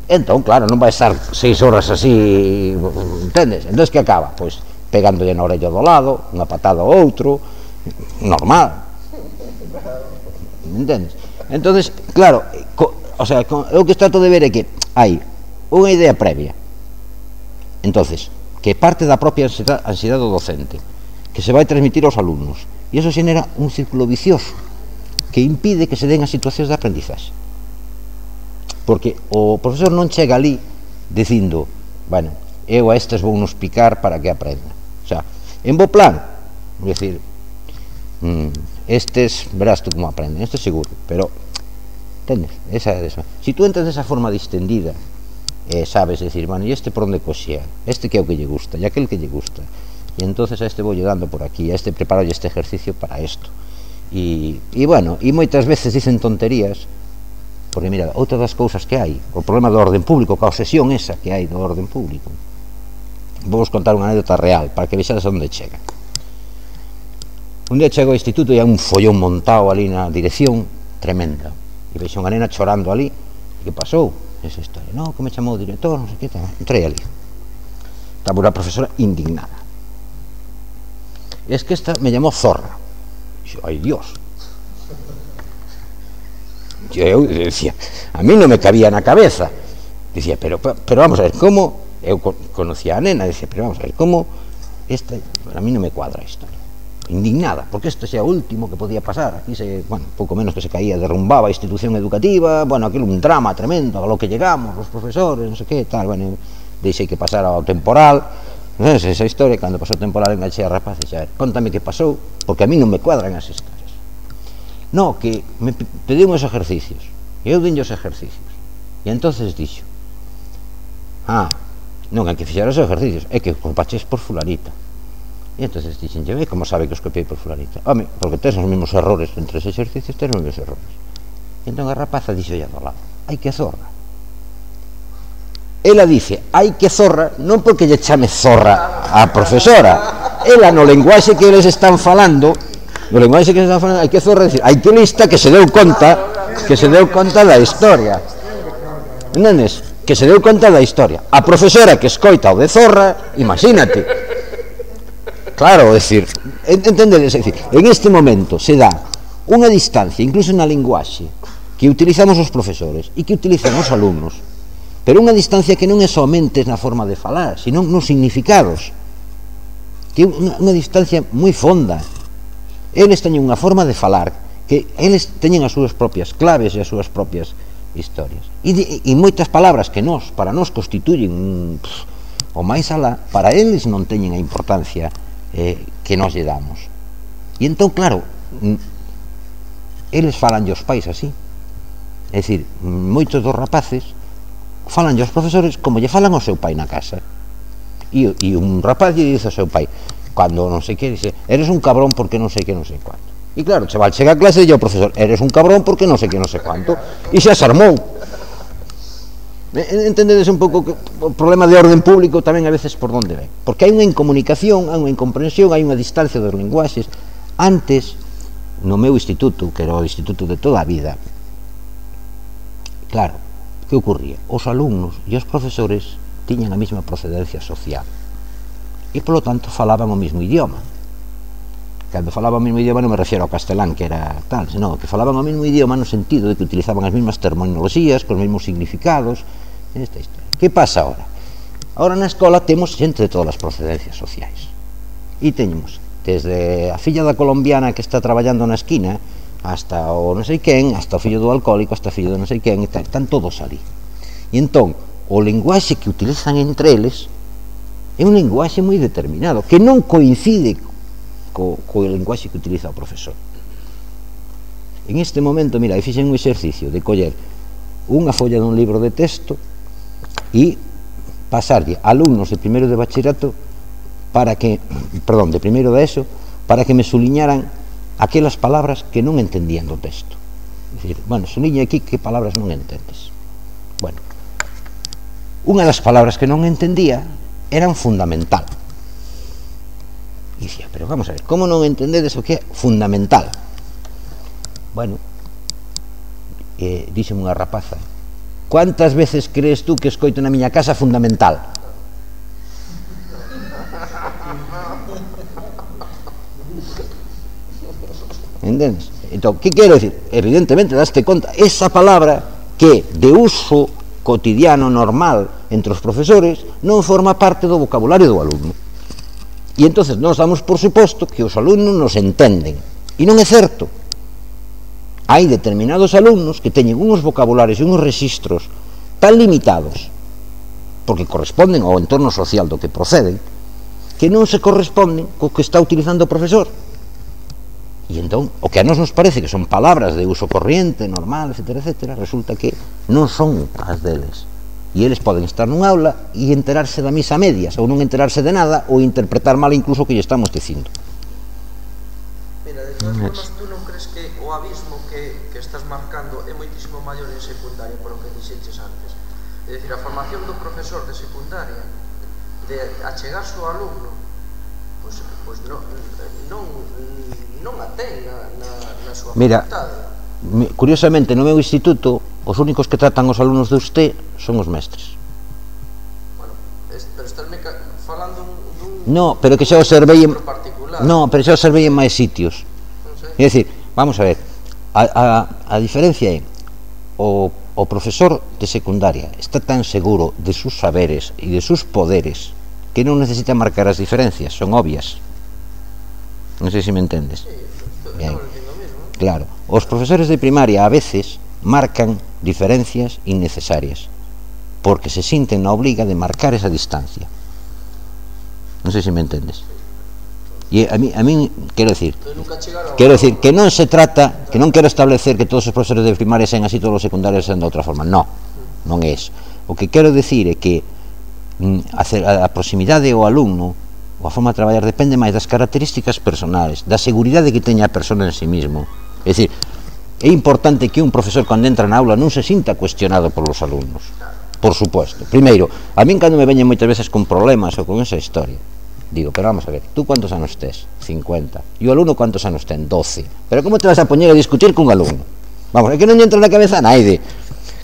Speaker 2: Entón, claro, non vai estar seis horas así, entendes? Entón, que acaba? Pois pegándolle na orella do lado, unha patada ao outro, normal. Entendes? Entonces, claro, co, o sea, co, o que trato de ver é que hai unha idea previa. Entonces, que parte da propia ansiedade, ansiedade do docente, que se vai transmitir aos alumnos, e iso xenera un círculo vicioso que impide que se den as situacións de aprendizaxe. Porque o profesor non chega ali dicindo, bueno, eu a estes vou nos picar para que aprenda. O sea, en bo plan, é dicir, estes, verás tú como aprenden, estes seguro, pero, entendes? Esa, esa. Si tú entras desa forma distendida, eh, sabes, decir, bueno, e este por onde coxea, este que é o que lle gusta, e aquel que lle gusta, e entonces a este vou lle dando por aquí, a este preparo este ejercicio para isto. E, e bueno, e moitas veces dicen tonterías, porque mira, outra das cousas que hai, o problema do orden público, ca obsesión esa que hai do orden público. Vou vos contar unha anécdota real, para que vexades onde chega. Un día chego ao instituto e hai un follón montado ali na dirección, tremenda, e vexo unha nena chorando ali. Que pasou? Esa historia, no, que me chamou o director, non sei que, entrei ali. Estaba unha profesora indignada. Es que esta me llamó zorra. Dixo, ai Dios. Eu decía, a mí non me cabía na cabeza. Dicía, pero, pero vamos a ver, como... Eu conocía a nena, decía, pero vamos a ver, como... Esta, a mí non me cuadra a historia. Indignada, porque isto xa é o último que podía pasar. Aquí se, bueno, pouco menos que se caía, derrumbaba a institución educativa, bueno, aquilo un drama tremendo, a lo que llegamos, os profesores, non sei que, tal, bueno, deixei que pasara ao temporal. Non sei, esa historia, cando pasou o temporal enganchei a rapaz e xa, contame que pasou, porque a mí non me cuadran as historias. No, que me pediu uns ejercicios, e eu dinlle os ejercicios, e entonces dixo, ah, non hai que fixar os ejercicios, é que copaches por fulanita. E entonces dixen, e como sabe que os copiei por fulanita? Home, porque tens os mesmos errores entre os exercicios, tens os mesmos errores. E entón a rapaza dixo ya do lado, hai que zorra. Ela dice, hai que zorra, non porque lle chame zorra a profesora, ela no lenguaxe que eles están falando, no lenguaxe que eles están falando, hai que zorra, decir, hai que lista que se deu conta, que se deu conta da historia. Entendes? Que se deu conta da historia. A profesora que escoita o de zorra, imagínate. Claro, decir, entendedes, decir, en este momento se dá unha distancia, incluso na linguaxe, que utilizamos os profesores e que utilizan os alumnos, pero unha distancia que non é somente na forma de falar, sino nos significados, que é unha, unha distancia moi fonda. Eles teñen unha forma de falar, que eles teñen as súas propias claves e as súas propias historias. E, e, e moitas palabras que nos, para nos constituyen pff, o máis alá, para eles non teñen a importancia eh, que nos lle damos. E entón, claro, eles falan aos pais así. É dicir, moitos dos rapaces falan aos profesores como lle falan ao seu pai na casa. E, e un rapaz lle dice ao seu pai, cando non sei que, dice, eres un cabrón porque non sei que non sei cuánto. E claro, o chaval chega a clase e lle o profesor, eres un cabrón porque non sei que non sei cuánto. E xa se armou. Entendedes un pouco que o problema de orden público tamén a veces por onde ven. Porque hai unha incomunicación, hai unha incomprensión, hai unha distancia dos linguaxes. Antes, no meu instituto, que era o instituto de toda a vida, claro, que ocurría? Os alumnos e os profesores tiñan a mesma procedencia social e, polo tanto, falaban o mesmo idioma. Cando falaban o mesmo idioma non me refiero ao castelán, que era tal, senón que falaban o mesmo idioma no sentido de que utilizaban as mesmas terminoloxías, cos mesmos significados, esta historia. Que pasa agora? Agora na escola temos xente de todas as procedencias sociais. E teñemos desde a filla da colombiana que está traballando na esquina, hasta o non sei quen, hasta o fillo do alcohólico, hasta o fillo do non sei quen, e tal, están todos ali. E entón, o linguaxe que utilizan entre eles é un linguaxe moi determinado, que non coincide co, co linguaxe que utiliza o profesor. En este momento, mira, fixen un exercicio de coller unha folla dun libro de texto e pasarlle a alumnos de primeiro de bachillerato para que, perdón, de primeiro de eso, para que me suliñaran aquelas palabras que non entendían do texto. É dicir, bueno, suliña aquí que palabras non entendes. Bueno, unha das palabras que non entendía eran fundamental. E dicía, pero vamos a ver, como non entendedes o que é fundamental? Bueno, eh, díxeme unha rapaza: "Cuántas veces crees tú que escoito na miña casa fundamental?" Entendes? Entón, que quero dicir? Evidentemente, daste conta, esa palabra que de uso cotidiano normal entre os profesores non forma parte do vocabulario do alumno. E entonces nós damos por suposto que os alumnos nos entenden. E non é certo. Hai determinados alumnos que teñen uns vocabularios e uns registros tan limitados, porque corresponden ao entorno social do que proceden, que non se corresponden co que está utilizando o profesor. E entón, o que a nós nos parece que son palabras de uso corriente, normal, etcétera, etcétera, resulta que non son as deles. E eles poden estar nun aula e enterarse da misa a medias, ou non enterarse de nada, ou interpretar mal incluso o que lle estamos dicindo.
Speaker 4: Mira, de todas formas, tú non crees que o abismo que, que estás marcando é moitísimo maior en secundaria, por o que dixeches antes? É dicir, a formación do profesor de secundaria, de achegarse ao alumno, pois, pois non, non, non a ten na, na, na súa
Speaker 2: Mira,
Speaker 4: facultade.
Speaker 2: Curiosamente, no meu instituto, os únicos que tratan os alumnos de usted son os mestres.
Speaker 4: Bueno, es, pero estás falando dun...
Speaker 2: No, pero que xa o servei en...
Speaker 4: particular.
Speaker 2: No, pero xa o servei en máis sitios.
Speaker 4: Non sei.
Speaker 2: É dicir, vamos a ver, a, a, a diferencia é o, o profesor de secundaria está tan seguro de sus saberes e de sus poderes que non necesita marcar as diferencias, son obvias. Non sei se me entendes.
Speaker 4: Sí,
Speaker 2: Bien.
Speaker 4: estamos dicindo o mismo.
Speaker 2: Claro, os profesores de primaria a veces marcan diferencias innecesarias porque se sinten na obliga de marcar esa distancia. Non sei se me entendes. E a mí, a mí quero decir, quero decir que non se trata, que non quero establecer que todos os profesores de primaria sean así, todos os secundarios sean de outra forma. No, non é eso. O que quero decir é que a proximidade ao alumno, ou a forma de traballar, depende máis das características personales, da seguridade que teña a persona en sí mismo. É dicir, é importante que un profesor, cando entra na aula, non se sinta cuestionado polos alumnos, por suposto. Primeiro, a min cando me veñen moitas veces con problemas ou con esa historia, digo, pero vamos a ver, tú cuántos anos tes? cincuenta. E o alumno cuántos anos ten? doce. Pero como te vas a poñer a discutir cun alumno? Vamos, é que non lle entra na cabeza a naide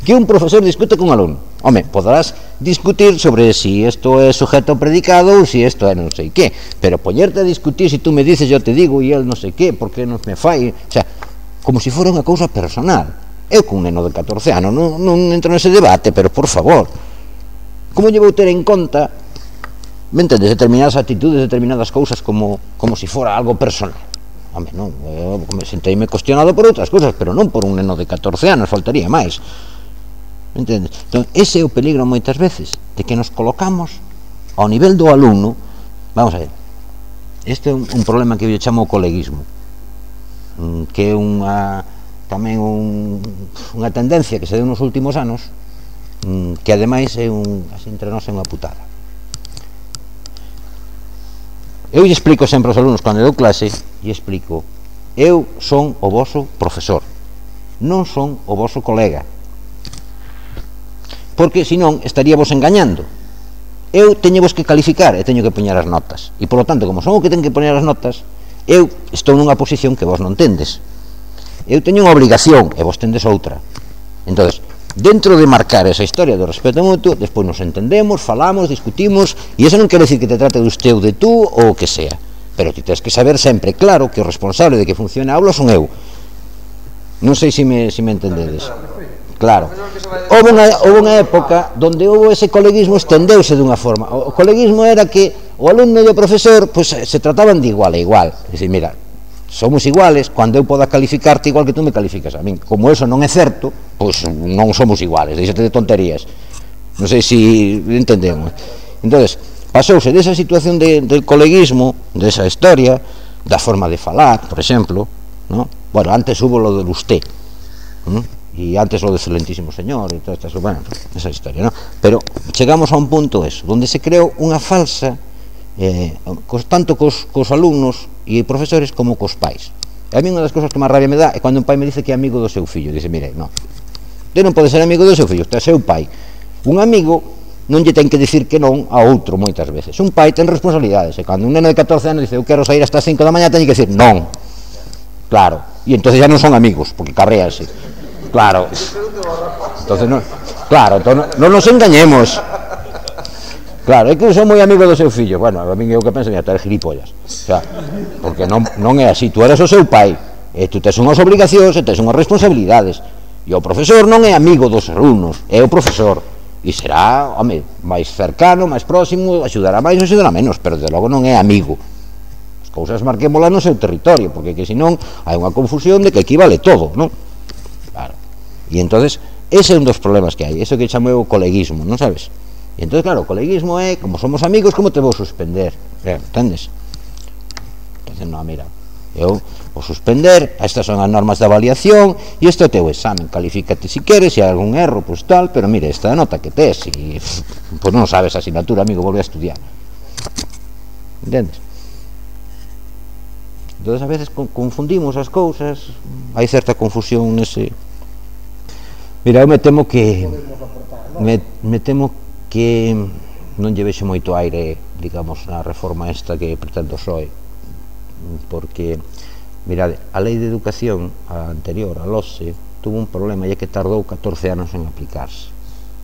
Speaker 2: que un profesor discute con un alumno. Home, podrás discutir sobre si isto é sujeto predicado ou si isto é non sei que, pero poñerte a discutir si tú me dices, yo te digo, e el non sei que, porque non me fai, o sea, como se fora unha cousa personal. Eu con un neno de catorce anos non, non entro nese debate, pero por favor, como lle vou ter en conta, me entendes, determinadas actitudes, determinadas cousas como, como si fora algo personal? Home, non, eu me senteime cuestionado por outras cousas, pero non por un neno de catorce anos, faltaría máis. Entendes? Entón, ese é o peligro moitas veces, de que nos colocamos ao nivel do alumno. Vamos a ver, este é un, un problema que eu chamo o coleguismo, que é unha tamén un, unha tendencia que se deu nos últimos anos, que ademais é un, así entre nós é unha putada. Eu lle explico sempre aos alumnos cando dou clase, lle explico, eu son o voso profesor, non son o voso colega, porque senón estaríamos engañando. Eu teño vos que calificar e teño que poñer as notas, e polo tanto, como son o que ten que poñer as notas, eu estou nunha posición que vos non tendes. Eu teño unha obligación e vos tendes outra. Entonces, dentro de marcar esa historia do respeto mutuo, despois nos entendemos, falamos, discutimos, e iso non quere decir que te trate de usted ou de tú ou o que sea, pero ti tens que saber sempre claro que o responsable de que funcione a aula son eu. Non sei se me, se me entendedes. Claro, houve unha, houve unha época onde houve ese coleguismo, estendeuse dunha forma. O coleguismo era que o alumno e o profesor pues, se trataban de igual a igual. É dicir, mira, somos iguales, cando eu poda calificarte igual que tú me calificas a min. Como eso non é certo, pois non somos iguales, deixate de tonterías. Non sei se entendemos. Entonces, pasouse desa situación de, del coleguismo, desa historia, da forma de falar, por exemplo, ¿no? Bueno, antes hubo lo del usted, ¿no? E antes lo de excelentísimo señor e todas estas, bueno, esa historia, ¿no? Pero chegamos a un punto eso, donde se creou unha falsa eh, cos, tanto cos, cos alumnos e profesores como cos pais. E a mí unha das cousas que máis rabia me dá é cando un pai me dice que é amigo do seu fillo. Dice, mire, non, usted non pode ser amigo do seu fillo, usted é seu pai. Un amigo non lle ten que dicir que non a outro moitas veces. Un pai ten responsabilidades, e cando un neno de catorce anos dice eu quero sair hasta as cinco da mañá, ten que dicir non. Claro, e entonces ya non son amigos, porque cabréanse. Claro. Entonces, no, claro, entón, non nos engañemos. Claro, é que eu sou moi amigo do seu fillo. Bueno, a mí é o que penso, mira, tú eres gilipollas. O sea, porque non, non é así, tú eres o seu pai. E tú tes unhas obrigacións e tes unhas responsabilidades. E o profesor non é amigo dos alumnos, é o profesor. E será, home, máis cercano, máis próximo, axudará máis ou axudará menos, pero desde logo non é amigo. As cousas marquémolas no seu territorio, porque que senón hai unha confusión de que aquí vale todo, non? Claro. E entonces, ese é un dos problemas que hai, eso que chamo o coleguismo, non sabes? E entón, claro, o coleguismo é, como somos amigos, como te vou suspender? Eh, entendes? Entonces, non, mira, eu vou suspender, estas son as normas de avaliación e este é o teu examen, califícate si queres, se hai algún erro, pois tal, pero mire, esta nota que tes e pois non sabes a asignatura, amigo, volve a estudiar. Entendes? Entón, a veces confundimos as cousas, hai certa confusión nese... Mira, eu me temo que me, me temo que non lle vexo moito aire, digamos, na reforma esta que pretendo o P S O E, porque mirade, a lei de educación a anterior, a LOSE, tuvo un problema e é que tardou catorce anos en aplicarse.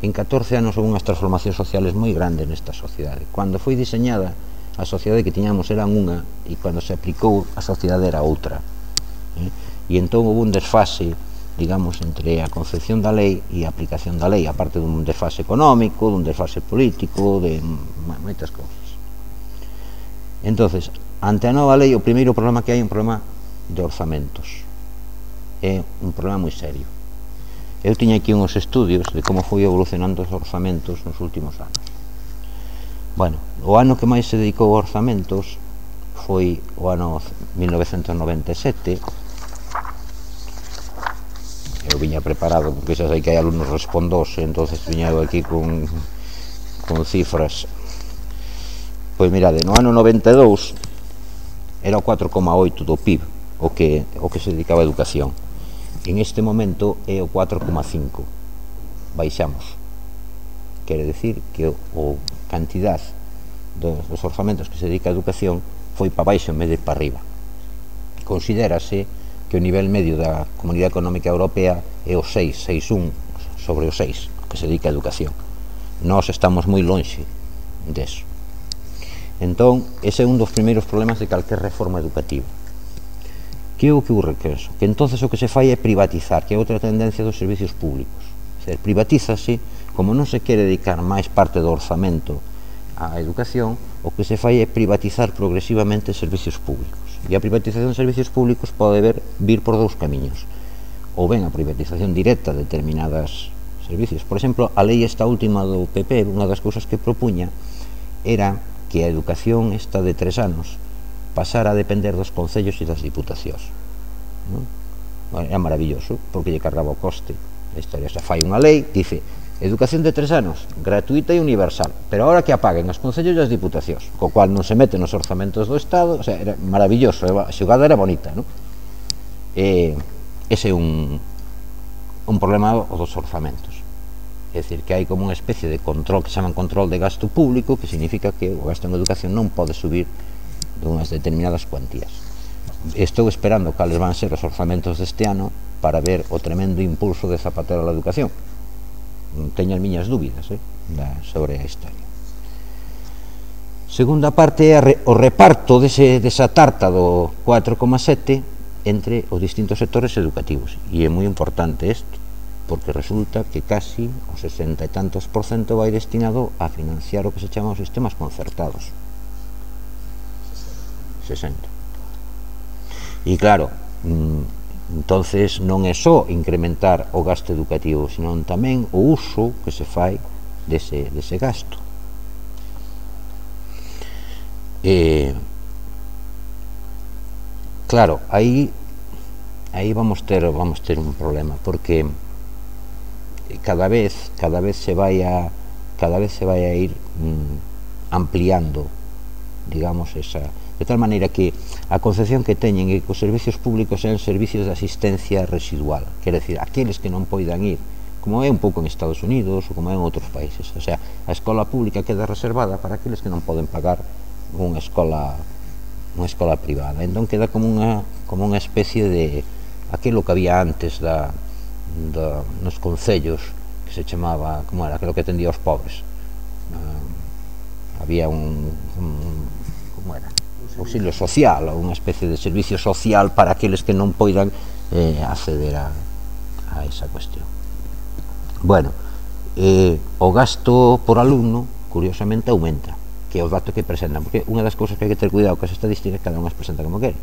Speaker 2: En catorce anos houve unhas transformacións sociales moi grandes nesta sociedade. Cando foi diseñada, a sociedade que tiñamos era unha, e cando se aplicou, a sociedade era outra. Eh? E entón houve un desfase, digamos, entre a concepción da lei e a aplicación da lei, aparte dun desfase económico, dun desfase político, de moitas cousas. Entonces, ante a nova lei, o primeiro problema que hai é un problema de orzamentos. É un problema moi serio. Eu tiña aquí uns estudios de como foi evolucionando os orzamentos nos últimos anos. Bueno, o ano que máis se dedicou a orzamentos foi o ano mil novecentos noventa e sete. Eu viña preparado, porque xa sei que hai alumnos respondose, entonces viña eu aquí con, con cifras. Pois mirade, no ano noventa e dous era o catro coma oito do P I B o que, o que se dedicaba a educación. En este momento é o catro coma cinco. Baixamos. Quere decir que o, o cantidad dos, dos orzamentos que se dedica a educación foi para baixo en vez de para arriba. Considérase que o nivel medio da Comunidade Económica Europea é o seis, seis coma un sobre o seis, que se dedica a educación. Nós estamos moi lonxe deso. Entón, ese é un dos primeiros problemas de calquer reforma educativa. Que é o que ocurre que eso? Que entonces o que se fai é privatizar, que é outra tendencia dos servicios públicos. O sea, privatízase, como non se quere dedicar máis parte do orzamento á educación, o que se fai é privatizar progresivamente servicios públicos. E a privatización de servicios públicos pode ver, vir por dous camiños. Ou ben a privatización directa de determinados servicios. Por exemplo, a lei esta última do P P, unha das cousas que propuña era que a educación esta de tres anos pasara a depender dos concellos e das diputacións. Non? Era maravilloso, porque lle cargaba o coste. A historia xa fai unha lei, dice, educación de tres anos, gratuita e universal, pero ahora que apaguen os concellos e as diputacións, co cual non se mete nos orzamentos do Estado, o sea, era maravilloso, a xogada era bonita, non? E ese é un, un problema dos orzamentos. É dicir, que hai como unha especie de control que se chama control de gasto público, que significa que o gasto en educación non pode subir de unhas determinadas cuantías. Estou esperando cales van ser os orzamentos deste ano para ver o tremendo impulso de Zapatero á educación. Teño as miñas dúbidas eh, sobre a historia. Segunda parte é o reparto dese, desa tarta do catro coma sete entre os distintos sectores educativos. E é moi importante isto, porque resulta que casi o sesenta e tantos por cento vai destinado a financiar o que se chama os sistemas concertados. sesenta. E claro, entonces non é só incrementar o gasto educativo, senón tamén o uso que se fai dese, dese gasto. E, claro, aí aí vamos ter vamos ter un problema, porque cada vez cada vez se vai a cada vez se vai a ir mm, ampliando, digamos, esa, de tal maneira que a concepción que teñen é que os servicios públicos sean servicios de asistencia residual, quer decir, aqueles que non poidan ir, como é un pouco en Estados Unidos ou como é en outros países, o sea, a escola pública queda reservada para aqueles que non poden pagar unha escola unha escola privada, entón queda como unha como unha especie de aquilo que había antes da da, nos concellos que se chamaba, como era, aquilo que atendía aos pobres. Uh, había un, un como era, auxilio social, ou unha especie de servicio social para aqueles que non poidan eh, acceder a, a esa cuestión. Bueno, eh, o gasto por alumno, curiosamente, aumenta, que é o dato que presentan, porque unha das cousas que hai que ter cuidado con as estadísticas, cada unha as presenta como quere.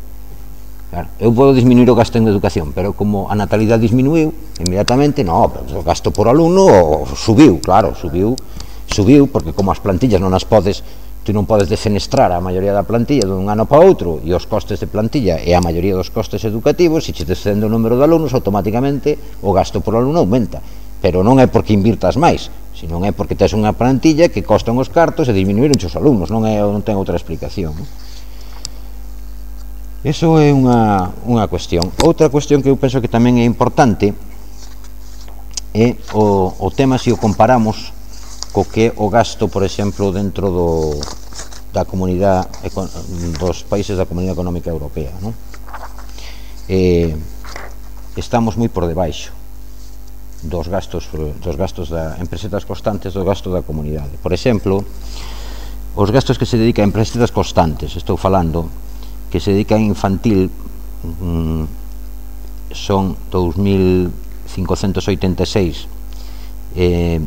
Speaker 2: Claro, eu podo disminuir o gasto en educación, pero como a natalidade disminuiu, inmediatamente, no, o gasto por alumno subiu, claro, subiu, subiu, porque como as plantillas non as podes, tú non podes defenestrar a maioría da plantilla dun ano para outro, e os costes de plantilla e a maioría dos costes educativos, se che descende o número de alumnos, automáticamente o gasto por alumno aumenta, pero non é porque invirtas máis, sino é porque tes unha plantilla que costan os cartos e disminuíron os alumnos, non, é, non ten outra explicación. Eso é unha, unha cuestión. Outra cuestión que eu penso que tamén é importante é o, o tema se o comparamos co que o gasto, por exemplo, dentro do, da comunidade, dos países da Comunidade Económica Europea, non? Eh, estamos moi por debaixo dos gastos, dos gastos da, en pesetas constantes do gasto da comunidade. Por exemplo, os gastos que se dedican en pesetas constantes, estou falando, que se dedican a infantil, mm, son dous mil cincocentos oitenta e seis, eh,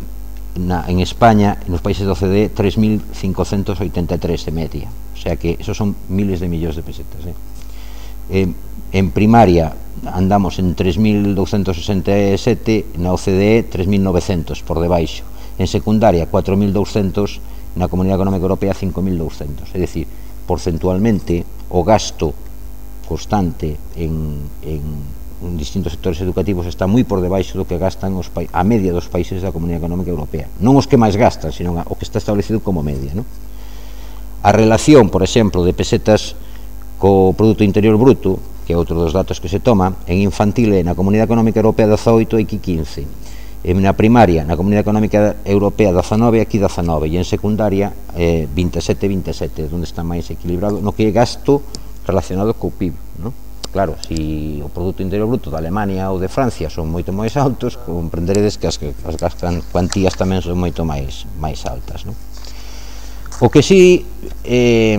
Speaker 2: Na, en España, nos países da O C D E, tres mil cincocentos oitenta e tres de media, o sea que esos son miles de millóns de pesetas. Eh? Eh, en primaria andamos en tres mil douscentos sesenta e sete, na O C D E tres mil novecentos, por debaixo. En secundaria cuatro mil douscentos, na Comunidade Económica Europea cinco mil douscentos. É dicir, porcentualmente, o gasto constante en, en en distintos sectores educativos está moi por debaixo do que gastan os a media dos países da Comunidade Económica Europea, non os que máis gastan, sino o que está establecido como media, non? A relación, por exemplo, de pesetas co Produto Interior Bruto, que é outro dos datos que se toma, en infantil e na Comunidade Económica Europea dezaoito e aquí quince, en na primaria na Comunidade Económica Europea dezanove e aquí dezanove, e en secundaria eh, vinte e sete e vinte e sete, onde está máis equilibrado no que é gasto relacionado co P I B, non? Claro, se o Produto Interior Bruto da Alemania ou de Francia son moito máis altos, comprenderedes que as, as gastan cuantías tamén son moito máis máis altas, non? O que si eh,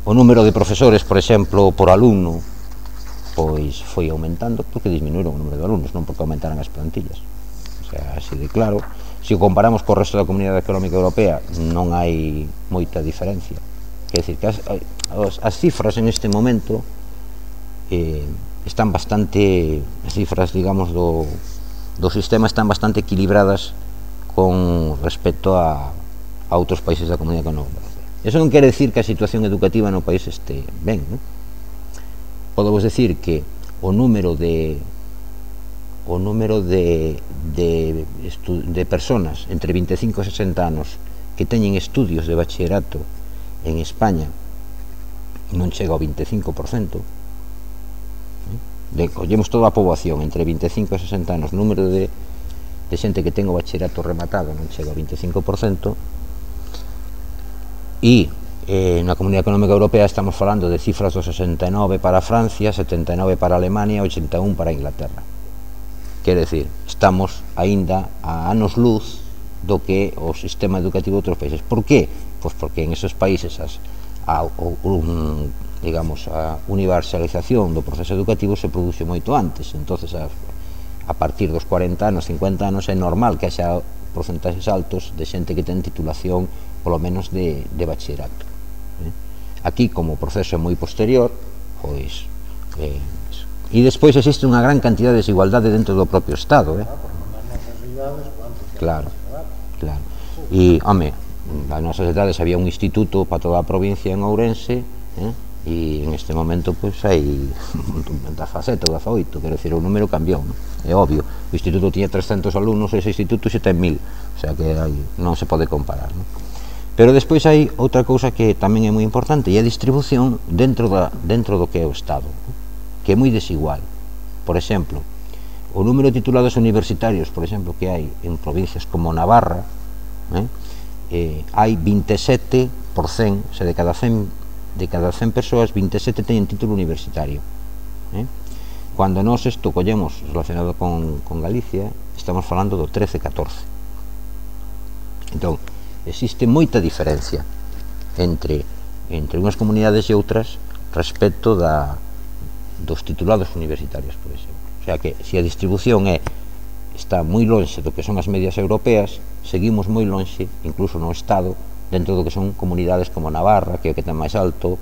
Speaker 2: o número de profesores, por exemplo, por alumno, pois foi aumentando porque disminuíron o número de alumnos, non porque aumentaran as plantillas. O sea, así de claro, se o comparamos co resto da Comunidade Económica Europea, non hai moita diferencia. Quer dizer, que as, as, as cifras en este momento eh, están bastante, as cifras, digamos, do, do sistema están bastante equilibradas con respecto a, a outros países da Comunidade Económica Europea. Eso non quere decir que a situación educativa no país este ben, non? Podemos decir que o número de o número de, de, de personas entre vinte e cinco e sesenta anos que teñen estudios de bachillerato en España non chega ao vinte e cinco por cento. De, collemos toda a poboación entre vinte e cinco e sesenta anos, número de, de xente que ten o bachillerato rematado non chega ao vinte e cinco por cento, e eh, na Comunidade Económica Europea estamos falando de cifras do sesenta e nove para Francia, setenta e nove para Alemania e oitenta e un para Inglaterra. Quer decir, estamos aínda a anos luz do que o sistema educativo de outros países. Por qué? Pois porque en esos países as, a, un, digamos, a universalización do proceso educativo se produce moito antes, entonces a, a partir dos cuarenta anos, cincuenta anos é normal que haxa porcentaxes altos de xente que ten titulación polo menos de, de bachillerato. Eh? Aquí, como o proceso é moi posterior, pois eh, e despois existe unha gran cantidad de desigualdade dentro do propio Estado, eh? Claro, claro. E, home, nas nosas edades había un instituto para toda a provincia en Ourense, eh? E en este momento pois hai dezasete ou dezaoito, quero dicir, o número cambiou, non? É obvio, o instituto tiña trescentos alumnos e ese instituto xe ten mil, o sea que hai, non se pode comparar, non? Pero despois hai outra cousa que tamén é moi importante, e a distribución dentro, da, dentro do que é o Estado, non? Que é moi desigual. Por exemplo, o número de titulados universitarios, por exemplo, que hai en provincias como Navarra, eh? Eh, hai vinte e sete por cento, o sea, de cada cen de cada cen persoas, vinte e sete teñen título universitario, eh? Cando nós isto collemos relacionado con, con Galicia, estamos falando do trece catorce. Entón, existe moita diferencia entre entre unhas comunidades e outras respecto da, dos titulados universitarios, por exemplo. O sea que, se a distribución é está moi lonxe do que son as medias europeas, seguimos moi lonxe, incluso no Estado, dentro do que son comunidades como Navarra, que é o que ten máis alto,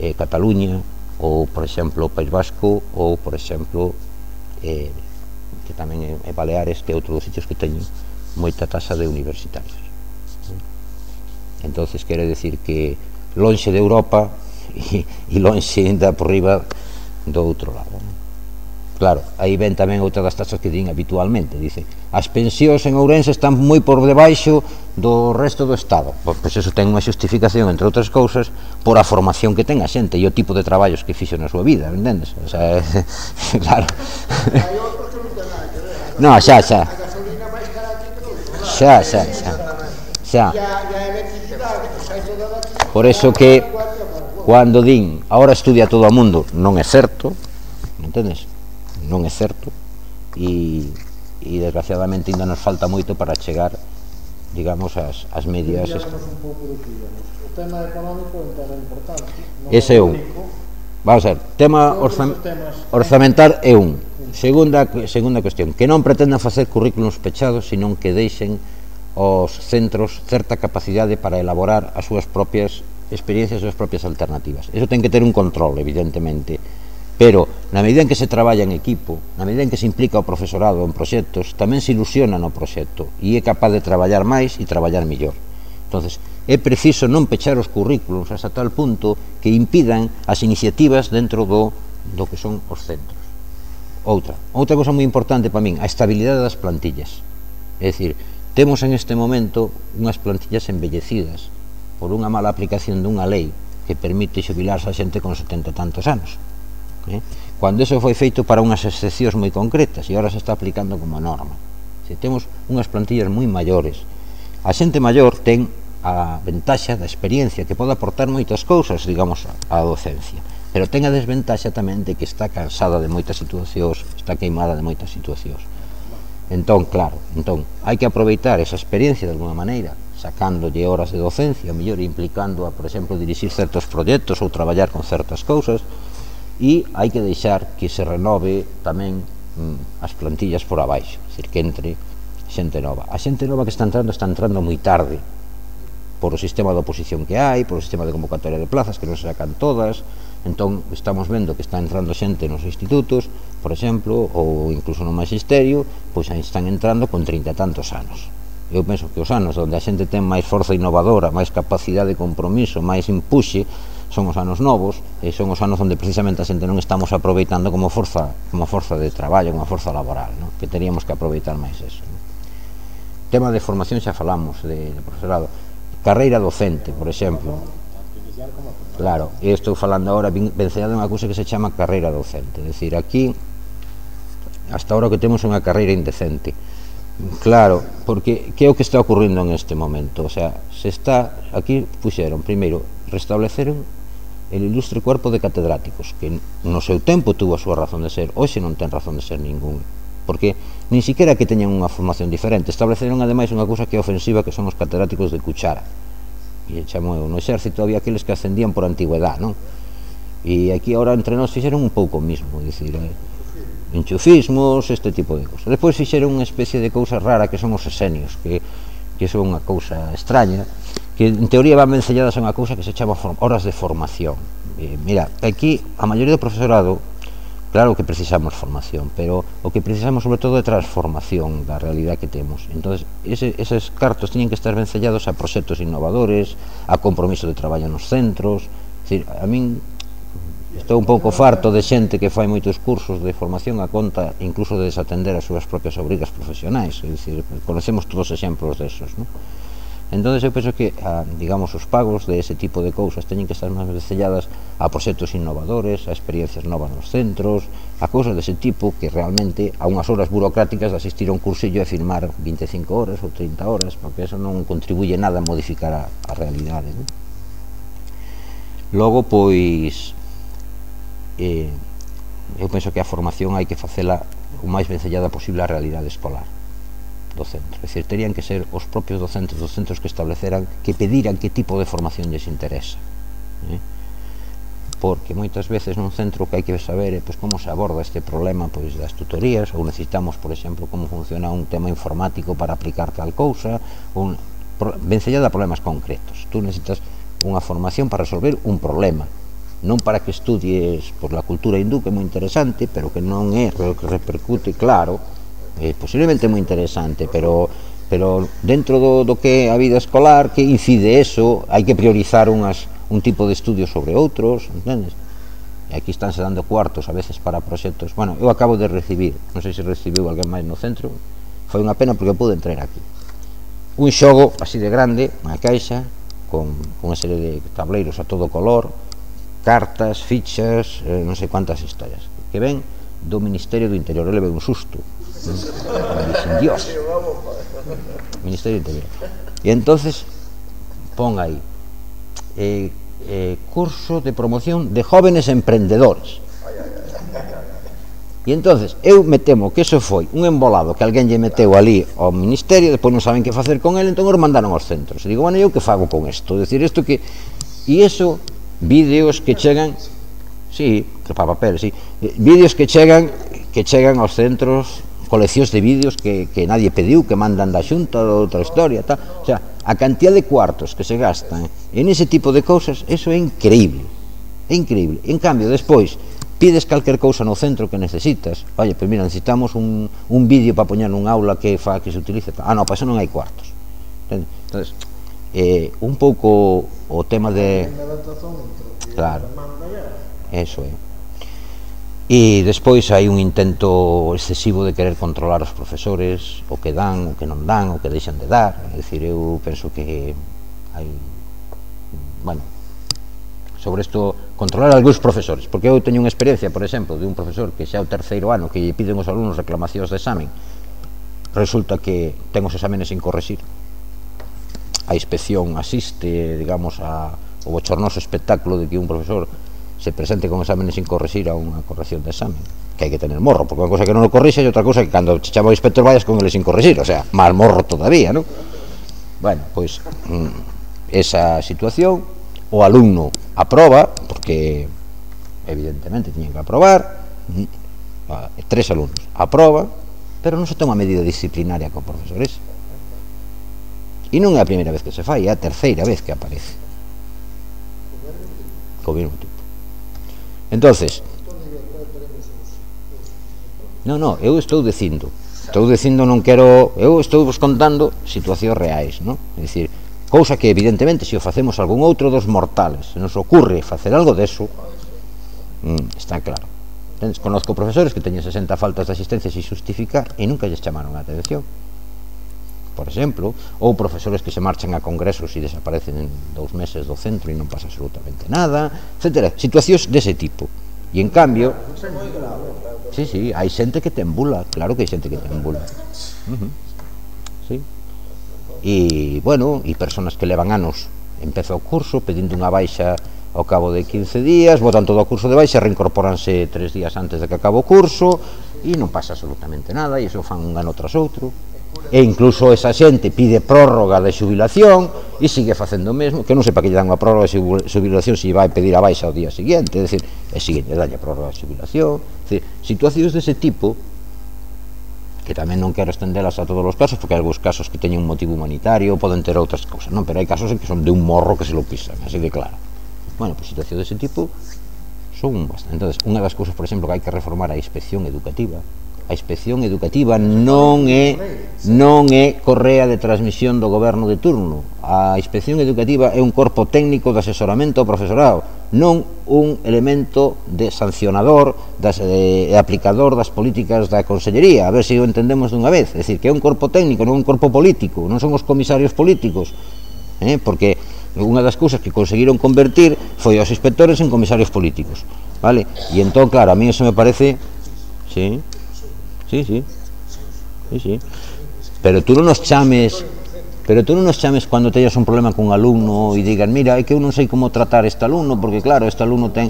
Speaker 2: eh, Cataluña, ou, por exemplo, País Vasco, ou, por exemplo, eh, que tamén é, é Baleares, que é outro dos sitios que teñen moita tasa de universitarios. Entonces, quere decir que lonxe de Europa e, e lonxe ainda por riba do outro lado. Claro, aí ven tamén outra das tasas que din habitualmente, dice, as pensións en Ourense están moi por debaixo do resto do Estado. Pois eso ten unha xustificación, entre outras cousas, por a formación que ten a xente e o tipo de traballos que fixo na súa vida, entendes? O sea, claro. No, xa, xa. Xa, xa, xa. Xa. Por eso que cando din ahora estudia todo o mundo, non é certo, entendes? Non é certo, e, e desgraciadamente ainda nos falta moito para chegar, digamos, as, as medias.
Speaker 3: O tema económico é un tema importante.
Speaker 2: Ese é un. Vamos a ver, tema orzam, orzamentar é un. Segunda, segunda cuestión, que non pretendan facer currículos pechados, senón que deixen aos centros certa capacidade para elaborar as súas propias experiencias, as súas propias alternativas. Eso ten que ter un control, evidentemente, pero na medida en que se traballa en equipo, na medida en que se implica o profesorado en proxectos, tamén se ilusiona no proxecto e é capaz de traballar máis e traballar mellor. Entonces, é preciso non pechar os currículos hasta tal punto que impidan as iniciativas dentro do, do que son os centros. Outra, outra cosa moi importante para min, a estabilidade das plantillas. É dicir, temos en este momento unhas plantillas embellecidas por unha mala aplicación dunha lei que permite xubilarse a xente con setenta e tantos anos. Eh? Cando eso foi feito para unhas excepcións moi concretas e agora se está aplicando como norma. Se temos unhas plantillas moi maiores, a xente maior ten a ventaxa da experiencia que pode aportar moitas cousas, digamos, á docencia, pero ten a desventaxa tamén de que está cansada de moitas situacións, está queimada de moitas situacións. Entón, claro, entón, hai que aproveitar esa experiencia de alguna maneira, sacándolle horas de docencia, mellor implicando a, por exemplo, dirixir certos proxectos ou traballar con certas cousas, e hai que deixar que se renove tamén mm, as plantillas por abaixo, é dicir, que entre xente nova. A xente nova que está entrando está entrando moi tarde por o sistema de oposición que hai, por o sistema de convocatoria de plazas que non se sacan todas. Entón estamos vendo que está entrando xente nos institutos, por exemplo, ou incluso no magisterio, pois aí están entrando con trinta e tantos anos. Eu penso que os anos onde a xente ten máis forza innovadora, máis capacidade de compromiso, máis impuxe, son os anos novos, e son os anos onde precisamente a xente non estamos aproveitando como forza, como forza de traballo, como forza laboral, ¿no? Que teríamos que aproveitar máis eso, ¿no? Tema de formación xa falamos, de, de profesorado. Carreira docente, por exemplo. Claro, e estou falando agora vencellado unha cousa que se chama carreira docente, é dicir, aquí hasta ahora o que temos é unha carreira indecente. Claro, porque que é o que está ocurrindo en este momento? O sea, se está, aquí puxeron, primeiro, restableceron el ilustre cuerpo de catedráticos, que no seu tempo tuvo a súa razón de ser, hoxe non ten razón de ser ningún, porque nin siquiera que teñan unha formación diferente. Estableceron ademais unha cousa que é ofensiva, que son os catedráticos de cuchara, e chamo eu, no exército había aqueles que ascendían por antigüedad, non? E aquí ahora entre nós fixeron un pouco o mismo, dicir, eh, enchufismos, este tipo de cosas. Despois fixeron unha especie de cousa rara que son os esenios, que, que son unha cousa extraña, que en teoría van vencelladas a unha cousa que se chama horas de formación. Eh, mira, aquí a maioría do profesorado, claro que precisamos formación, pero o que precisamos sobre todo é transformación da realidad que temos. Entón, ese, eses cartos teñen que estar vencellados a proxectos innovadores, a compromiso de traballo nos centros. É dicir, a min estou un pouco farto de xente que fai moitos cursos de formación a conta incluso de desatender as súas propias obrigas profesionais. É dicir, conocemos todos os exemplos desos, non? Entón, eu penso que, a, digamos, os pagos de ese tipo de cousas teñen que estar máis vencelladas a proxectos innovadores, a experiencias novas nos centros, a cousas dese tipo que realmente a unhas horas burocráticas de asistir a un cursillo e firmar vinte e cinco horas ou trinta horas, porque eso non contribuye nada a modificar a, a realidade, non? Logo, pois, eh, eu penso que a formación hai que facela o máis vencellada posible á realidade escolar do centro, é dicir, terían que ser os propios docentes dos centros que estableceran, que pediran que tipo de formación lles interesa, eh? Porque moitas veces nun centro o que hai que saber é pois, como se aborda este problema pois, das tutorías, ou necesitamos, por exemplo, como funciona un tema informático para aplicar tal cousa, un, vencellada a problemas concretos. Tú necesitas unha formación para resolver un problema, non para que estudies por la cultura hindú, que é moi interesante, pero que non é o que repercute, claro, é posiblemente moi interesante, pero pero dentro do, do que é a vida escolar, que incide eso, hai que priorizar unhas, un tipo de estudios sobre outros, entendes? E aquí estánse dando cuartos a veces para proxectos. Bueno, eu acabo de recibir, non sei se recibiu alguén máis no centro, foi unha pena porque eu pude entrar aquí. Un xogo así de grande, unha caixa, con, con unha serie de tableiros a todo color, cartas, fichas, eh, non sei cuántas historias, que ven do Ministerio do Interior. Eu levei un susto, me dixen, Dios, Ministerio do Interior. E entonces pon aí eh, eh, curso de promoción de jóvenes emprendedores. E entonces eu me temo que eso foi un embolado que alguén lle meteu ali ao Ministerio, depois non saben que facer con ele, entón os mandaron aos centros. E digo, bueno, eu que fago con isto? Decir, isto que... E iso, vídeos que chegan, sí, que para papel, sí, vídeos que chegan que chegan aos centros, coleccións de vídeos que, que nadie pediu, que mandan da xunta ou outra historia, tal. O sea, a cantidad de cuartos que se gastan en ese tipo de cousas, eso é increíble, é increíble. En cambio, despois, pides calquer cousa no centro que necesitas, oye, pois mira, necesitamos un, un vídeo para poñer nun aula que fa que se utilice, ah, non, para eso non hai cuartos. Entonces, eh, un pouco o tema de... Claro, eso é. E despois hai un intento excesivo de querer controlar os profesores, o que dan, o que non dan, o que deixan de dar. É dicir, eu penso que hai, bueno, sobre isto, controlar algúns profesores, porque eu teño unha experiencia, por exemplo, de un profesor que xa é o terceiro ano que lle piden os alumnos reclamacións de examen, resulta que ten os exámenes sin correxir, a inspección asiste, digamos, a, o bochornoso espectáculo de que un profesor se presente con exámenes sin correxir a unha corrección de examen, que hai que tener morro, porque unha cosa que non o corrixe e outra cosa que cando che chama o inspector vayas con ele sin correxir, o sea, máis morro todavía, non? Bueno, pois, mm, esa situación, o alumno aproba, porque evidentemente tiñen que aprobar, mm, tres alumnos aproba, pero non se toma medida disciplinaria con profesores. E non é a primeira vez que se fai, é a terceira vez que aparece co mesmo tipo. Entonces, non, non, eu estou dicindo estou dicindo, non quero, eu estou vos contando situacións reais, non? É dicir, cousa que evidentemente se o facemos algún outro dos mortales, se nos ocurre facer algo deso, mm, está claro. Entonces, conozco profesores que teñen sesenta faltas de asistencia sin justificar e nunca lles chamaron a atención, por exemplo, ou profesores que se marchan a congresos e desaparecen en dous meses do centro e non pasa absolutamente nada, etcétera. Situacións dese tipo. E en cambio, sí, sí, hai xente que te embula, claro que hai xente que te embula. Uh -huh. Sí. E, bueno, e personas que levan anos, empeza o curso pedindo unha baixa ao cabo de quince días, botan todo o curso de baixa, reincorporanse tres días antes de que acabe o curso e non pasa absolutamente nada, e iso fan un ano tras outro. E incluso esa xente pide prórroga de xubilación e sigue facendo o mesmo, que non sei para que lle dan unha prórroga de xubilación se vai pedir a baixa ao día seguinte, é dicir, e seguinte, dalle a prórroga de xubilación. É dicir, situacións dese tipo, que tamén non quero estendelas a todos os casos, porque hai algúns casos que teñen un motivo humanitario, poden ter outras cousas, non, pero hai casos en que son de un morro que se lo pisan, así de claro. Bueno, pois situacións dese tipo son bastante. Entón, unha das cousas, por exemplo, que hai que reformar a inspección educativa. A inspección educativa non é non é correa de transmisión do goberno de turno. A inspección educativa é un corpo técnico de asesoramento ao profesorado, non un elemento de sancionador das, de, de aplicador das políticas da consellería. A ver se o entendemos dunha vez. É dicir, que é un corpo técnico, non un corpo político, non son os comisarios políticos, eh? Porque unha das cousas que conseguiron convertir foi aos inspectores en comisarios políticos, vale? E entón, claro, a mí eso me parece, sí, sí, sí, sí, sí, pero tú non nos chames, pero tú non nos chames cando teñas un problema con un alumno e digan, mira, é que eu non sei como tratar este alumno, porque claro, este alumno ten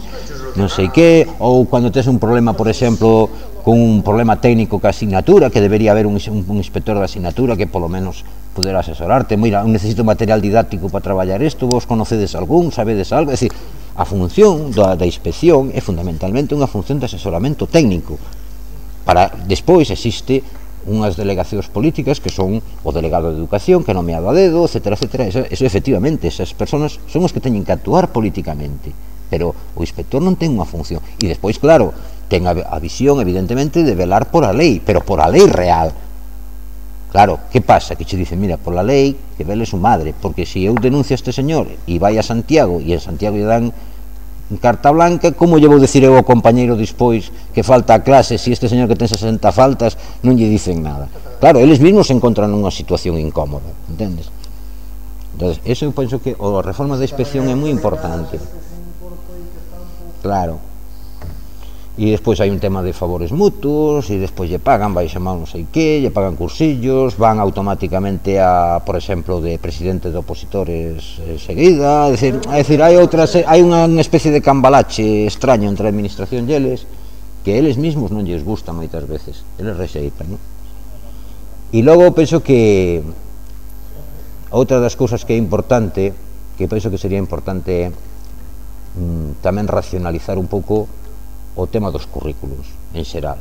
Speaker 2: non sei que, ou cando tes un problema, por exemplo, con un problema técnico ca asignatura, que debería haber un, un, un inspector da asignatura que polo menos poder asesorarte, mira, necesito material didáctico para traballar isto, vos conocedes algún, sabedes algo, é dicir, a función da, da inspección é fundamentalmente unha función de asesoramento técnico. Para despois existe unhas delegacións políticas que son o delegado de educación, que é nomeado a dedo, etcétera, etcétera. Eso, eso efectivamente, esas personas son os que teñen que actuar políticamente, pero o inspector non ten unha función. E despois, claro, ten a, a visión, evidentemente, de velar por a lei, pero por a lei real. Claro, que pasa? Que che dicen, mira, por la lei, que vele su madre, porque se eu denuncio a este señor e vai a Santiago, e en Santiago lle dan carta blanca, como lle vou dicir eu ao compañeiro despois que falta a clase, se este señor que ten sesenta faltas non lle dicen nada? Claro, eles mesmos se encontran nunha situación incómoda, entendes? Entón, eso eu penso que a reforma da inspección é moi importante. Claro. E despois hai un tema de favores mutuos, e despois lle pagan, vai chamar non sei que, lle pagan cursillos, van automáticamente a, por exemplo, de presidente de opositores seguida, é dicir, é dicir, hai outras, hai unha especie de cambalache extraño entre a administración e eles, que eles mesmos non lles gusta moitas veces, eles rexeitan, non? E logo penso que outra das cousas que é importante, que penso que sería importante mm, tamén racionalizar un pouco o tema dos currículos en xeral,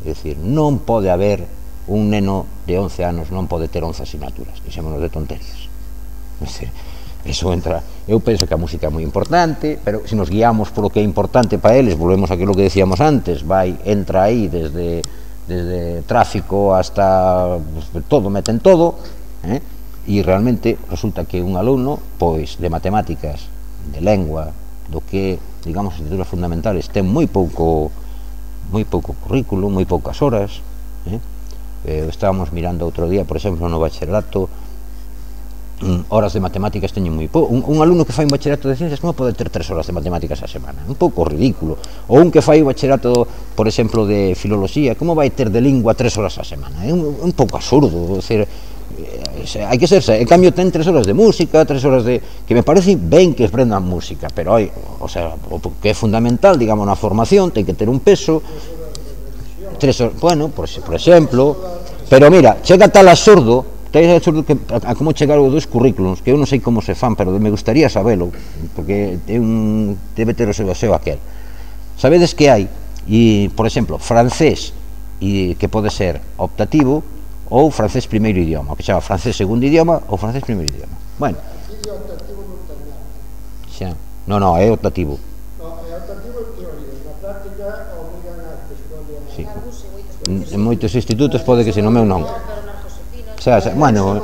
Speaker 2: é dicir, non pode haber un neno de once anos, non pode ter once asignaturas, dixémonos de tonterías, é dicir, eso entra, eu penso que a música é moi importante, pero se nos guiamos por o que é importante para eles, volvemos a aquilo que decíamos antes, vai, entra aí desde, desde tráfico hasta todo, meten todo, eh? E realmente resulta que un alumno, pois, de matemáticas, de lengua, do que, digamos, asignaturas fundamentales, ten moi pouco moi pouco currículo, moi poucas horas, eh? Eh, estábamos mirando outro día, por exemplo, no bacharelato, mm, horas de matemáticas teñen moi pouco. Un, un alumno que fai un bacharelato de ciencias non pode ter tres horas de matemáticas a semana, un pouco ridículo. Ou un que fai un bacharelato, por exemplo, de filoloxía, como vai ter de lingua tres horas a semana? É un, un pouco absurdo, é dicir, hai que serse, en cambio ten tres horas de música, tres horas de, que me parece ben que aprendan música, pero hai, o sea, o que é fundamental, digamos, na formación, ten que ter un peso, tres horas, bueno, por, por exemplo, pero mira, chega tal absurdo, tal absurdo que a, a como chegar os dos currículos, que eu non sei como se fan, pero me gustaría sabelo, porque é un, debe ter o seu, o seu aquel. Sabedes que hai, e, por exemplo, francés, e que pode ser optativo, ou francés primeiro idioma, o que chama francés segundo idioma ou francés primeiro idioma. Bueno, xa, non, non, é optativo.
Speaker 3: No, é optativo en teoría, na práctica obrigan a que escollan.
Speaker 2: Sí. En moitos institutos pode que se non, meu non. Xa, xa, bueno,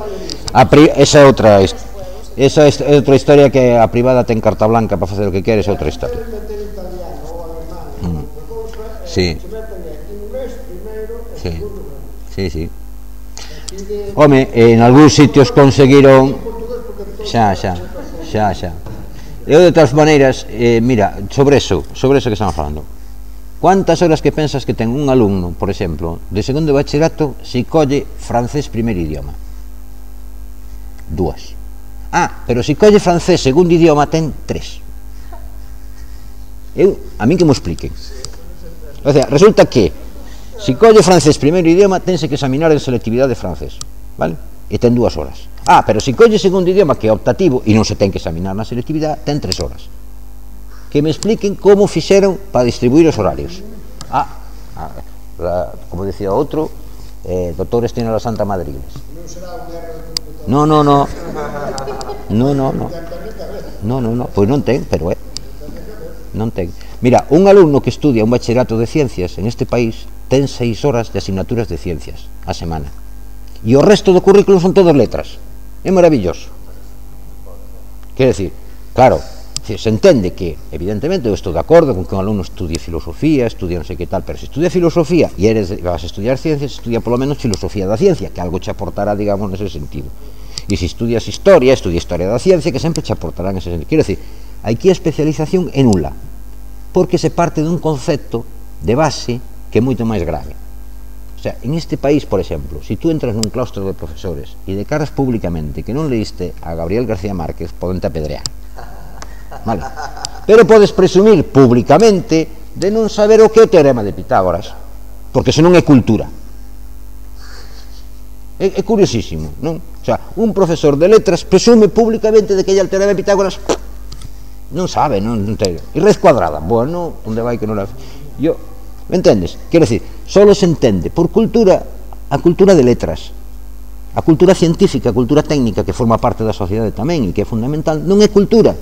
Speaker 2: a pri, esa é outra esa é outra historia, que a privada ten carta blanca para facer o que queres, é outra historia. Mm. Sí. Sí. Sí, sí. Home, en algúns sitios conseguiron, xa, xa, xa, xa. Eu, de todas maneiras, eh, mira, sobre eso, sobre eso que estamos falando, cuántas horas que pensas que ten un alumno, por exemplo, de segundo de bachillerato, se colle francés primeiro idioma? Dúas. Ah, pero se colle francés segundo idioma, ten tres. Eu, a min que me expliquen. O sea, resulta que se colle francés primeiro idioma, tense que examinar en selectividade de francés, vale? E ten dúas horas. Ah, pero se colle segundo idioma, que é optativo, e non se ten que examinar na selectividade, ten tres horas. Que me expliquen como fixeron para distribuir os horarios. Ah, ah como decía outro, eh, doctores tiene la Santa Madre Iglesia. No, no, no. No, no, no. No, no, no. Pois non ten, pero é. Non ten. Mira, un alumno que estudia un bachillerato de ciencias en este país ten seis horas de asignaturas de ciencias a semana, e o resto do currículo son todas letras. É maravilloso. Quer decir, claro, se entende que, evidentemente, eu estou de acordo con que un alumno estudie filosofía, estudie non sei que tal, pero se estudia filosofía e eres, vas a estudiar ciencias, estudia polo menos filosofía da ciencia, que algo che aportará, digamos, nese sentido. E se estudias historia, estudia historia da ciencia, que sempre che aportará nese sentido. Quero decir, aquí a especialización é nula, porque se parte dun concepto de base que é moito máis grave. O sea, en este país, por ejemplo, si tú entras nun claustro de profesores e declaras públicamente que non leíste a Gabriel García Márquez, podente apedrear. Vale. Pero podes presumir públicamente de non saber o que é o teorema de Pitágoras, porque senón é cultura. É, é curiosísimo, non? O sea, un profesor de letras presume públicamente de que é o teorema de Pitágoras, non sabe, non, non te... E raíz cuadrada, bueno, onde vai que non la... Yo, me entendes? Quero decir, solo se entende por cultura a cultura de letras, a cultura científica, a cultura técnica que forma parte da sociedade tamén e que é fundamental, non é cultura.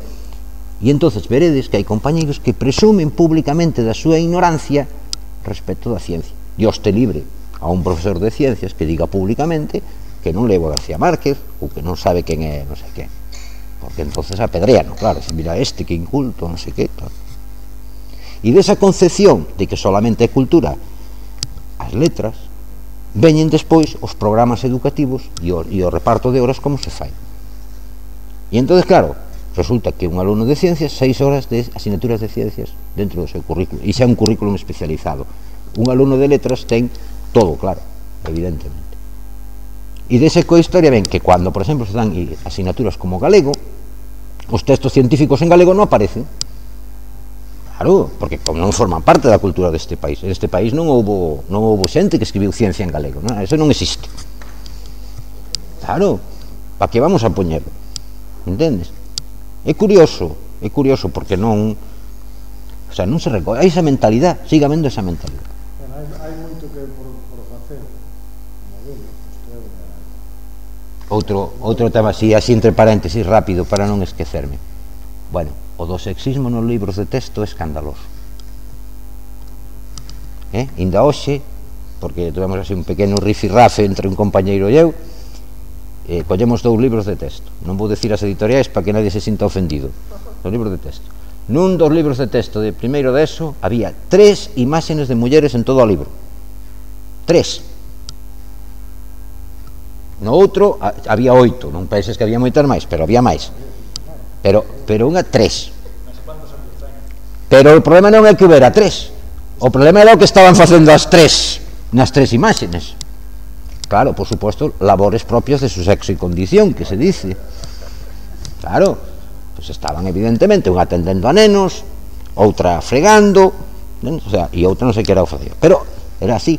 Speaker 2: E entonces veredes que hai compañeros que presumen públicamente da súa ignorancia respecto da ciencia. Dios te libre a un profesor de ciencias que diga públicamente que non leu a García Márquez ou que non sabe quen é non sei quen, porque entonces apedreano, claro, mira este que inculto, non sei que, claro. E desa concepción de que solamente é cultura as letras, veñen despois os programas educativos e o, e o reparto de horas como se fai. E entonces, claro, resulta que un alumno de ciencias, seis horas de asignaturas de ciencias dentro do seu currículo, e xa un currículum especializado. Un alumno de letras ten todo, claro, evidentemente. E desa cohistoria ven que cando, por exemplo, se dan asignaturas como galego, os textos científicos en galego non aparecen. Claro, porque como non forman parte da cultura deste país. En este país non houbo, non houbo xente que escribiu ciencia en galego, non? Eso non existe. Claro, para que vamos a poñerlo? Entendes? É curioso, é curioso porque non, o sea, non se recolle, hai esa mentalidade, sigue habendo esa mentalidade.
Speaker 3: Bueno, hai, hai moito que por, por facer, como digo, isto é unha...
Speaker 2: Outro, outro tema así, así entre paréntesis, rápido, para non esquecerme. Bueno, o do sexismo nos libros de texto é escandaloso. Eh? Inda hoxe, porque tivemos así un pequeno rifirrafe entre un compañeiro e eu, eh, collemos dous libros de texto. Non vou decir as editoriais para que nadie se sinta ofendido. Os libros de texto. Nun dos libros de texto de primeiro de eso había tres imágenes de mulleres en todo o libro. Tres. No outro a, había oito. Non penses que había moitas máis, pero había máis. Pero, pero unha tres. Pero o problema non é que houbera tres. O problema era o que estaban facendo as tres nas tres imágenes. Claro, por suposto, labores propios de su sexo e condición, que se dice. Claro, pues estaban evidentemente unha atendendo a nenos, outra fregando, o sea, e outra non sei que era o facía. Pero era así.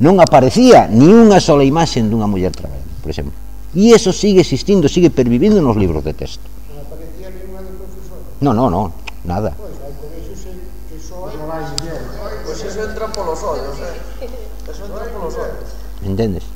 Speaker 2: Non aparecía ni unha sola imaxe dunha muller traballando, por exemplo. E eso sigue existindo, sigue pervivindo nos libros de texto.
Speaker 3: Non aparecía ninguna de profesora?
Speaker 2: No, no, no, nada.
Speaker 3: Pois, hai colexios que só hai máis mulleres.
Speaker 4: Pois eso entra polos ollos, eh? Eso entra polos ollos.
Speaker 2: Entendes?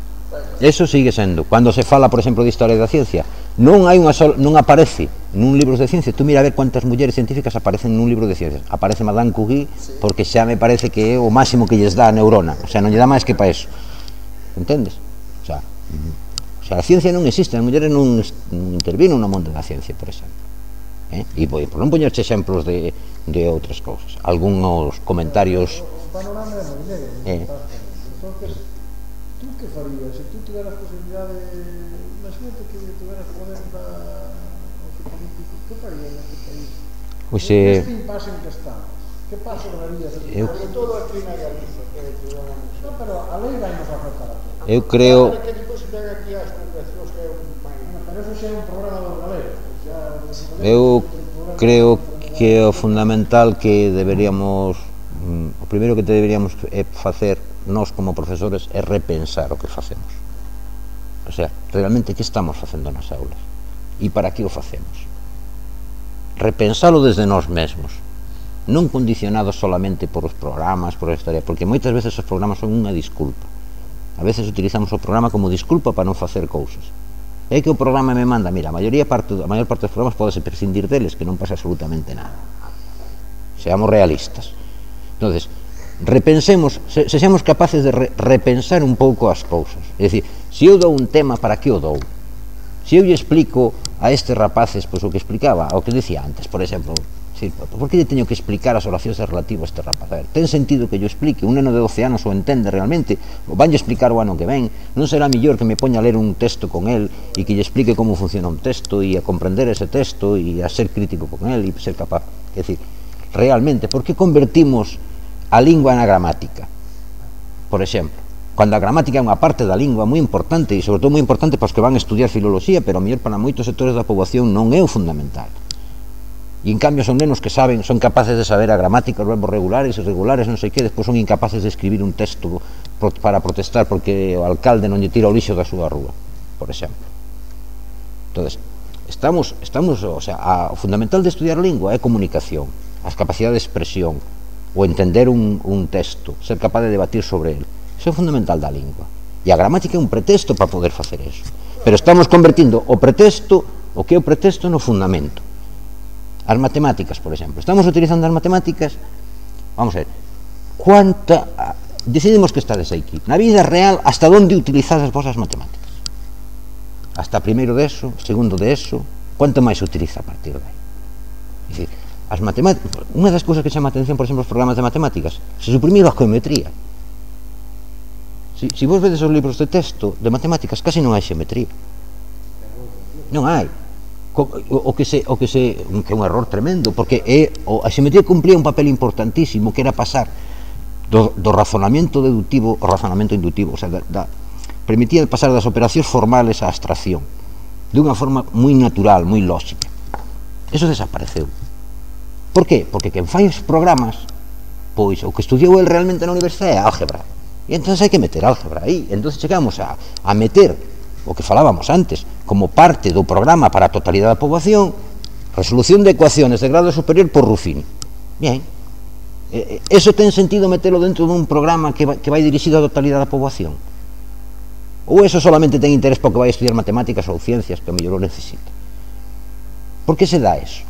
Speaker 2: Eso sigue sendo. Cando se fala, por exemplo, de historia da ciencia, non hai unha sola, non aparece nun libro de ciencia. Tú mira a ver cuántas mulleres científicas aparecen nun libro de ciencias. Aparece Madame Curie, porque xa me parece que é o máximo que lles dá a neurona. O sea, non lle dá máis que para eso. Entendes? O sea, o sea, a ciencia non existe, as mulleres non, non intervino no mundo da ciencia, por exemplo. Eh? E por non poñerche exemplos de, de outras cousas. Algunos comentarios...
Speaker 3: O panorama é moi negro.
Speaker 2: Eh.
Speaker 3: Entonces, tú que farías? Se tú tiveras posibilidade, imagínate que tiveras poder para o político, que farías neste país?
Speaker 2: Pois eh...
Speaker 3: Neste impasse en que estamos, que paso darías?
Speaker 2: Eu...
Speaker 3: Sobre todo aquí na Galiza, que é ciudadanos. No, pero a lei vai nos afectar a todos.
Speaker 2: Eu creo...
Speaker 3: Que depois se pega aquí as concrecións que é un país. Pero eso xa é un programa dos galegos.
Speaker 2: Eu creo que o fundamental que deberíamos, o primeiro que deberíamos é facer nós como profesores é repensar o que facemos. O sea, realmente que estamos facendo nas aulas e para que o facemos. Repensalo desde nós mesmos, non condicionados solamente por os programas, por a historia, porque moitas veces os programas son unha disculpa. A veces utilizamos o programa como disculpa para non facer cousas. É que o programa me manda, mira, a maioría parte, a maior parte dos programas podese prescindir deles, que non pasa absolutamente nada. Seamos realistas. Entonces, repensemos, se, sexamos capaces de re, repensar un pouco as cousas. É dicir, se eu dou un tema, para que o dou? Se eu lle explico a estes rapaces, pois o que explicaba, o que dicía antes, por exemplo, sí, por que lle teño que explicar as oracións relativas a este rapaz? A ver, ten sentido que yo explique? Un neno de doce anos o entende realmente? O vanlle explicar o ano que ven? Non será mellor que me poña a ler un texto con el e que lle explique como funciona un texto e a comprender ese texto e a ser crítico con el e ser capaz? É dicir, realmente, por que convertimos a lingua na gramática? Por exemplo, Cando a gramática é unha parte da lingua moi importante, e sobre todo moi importante para os que van a estudiar filoloxía, pero a mellor para moitos sectores da poboación non é o fundamental. E en cambio son nenos que saben, son capaces de saber a gramática, os verbos regulares, irregulares, non sei que, despois son incapaces de escribir un texto para protestar porque o alcalde non lle tira o lixo da súa rúa, por exemplo. Entonces, estamos, estamos, o sea, a, o fundamental de estudiar lingua é comunicación, as capacidades de expresión, o entender un, un texto, ser capaz de debatir sobre ele. Iso é fundamental da lingua. E a gramática é un pretexto para poder facer eso. Pero estamos convertindo o pretexto, o que é o pretexto, no fundamento. As matemáticas, por exemplo. Estamos utilizando as matemáticas, vamos a ver, cuánta... Decidimos que estades aquí. Na vida real, hasta onde utilizas as vosas matemáticas? Hasta primeiro de eso, segundo de eso, quanto máis se utiliza a partir de aí? É dicir, as matemáticas... Unha das cousas que chama a atención, por exemplo, os programas de matemáticas, se suprimiu a geometría. Si, si vos vedes os libros de texto de matemáticas, casi non hai xeometría. Non hai. O, o, que se, o que se que é un error tremendo, porque é, o, a xeometría cumplía un papel importantísimo, que era pasar do, do razonamento deductivo ao razonamento inductivo, o sea, da, da, permitía pasar das operacións formales á abstracción de unha forma moi natural, moi lógica. Eso desapareceu. Por qué? Porque quen fai os programas, pois o que estudiou el realmente na universidade é álgebra. E entón hai que meter álgebra aí. Entón chegamos a, a meter o que falábamos antes como parte do programa para a totalidade da poboación, resolución de ecuaciones de grado superior por Ruffini. Bien, eh, eso ten sentido metelo dentro dun programa que vai, que vai dirixido á totalidade da poboación? Ou eso solamente ten interés porque vai estudiar matemáticas ou ciencias, que o mellor o necesita? Por que se dá eso?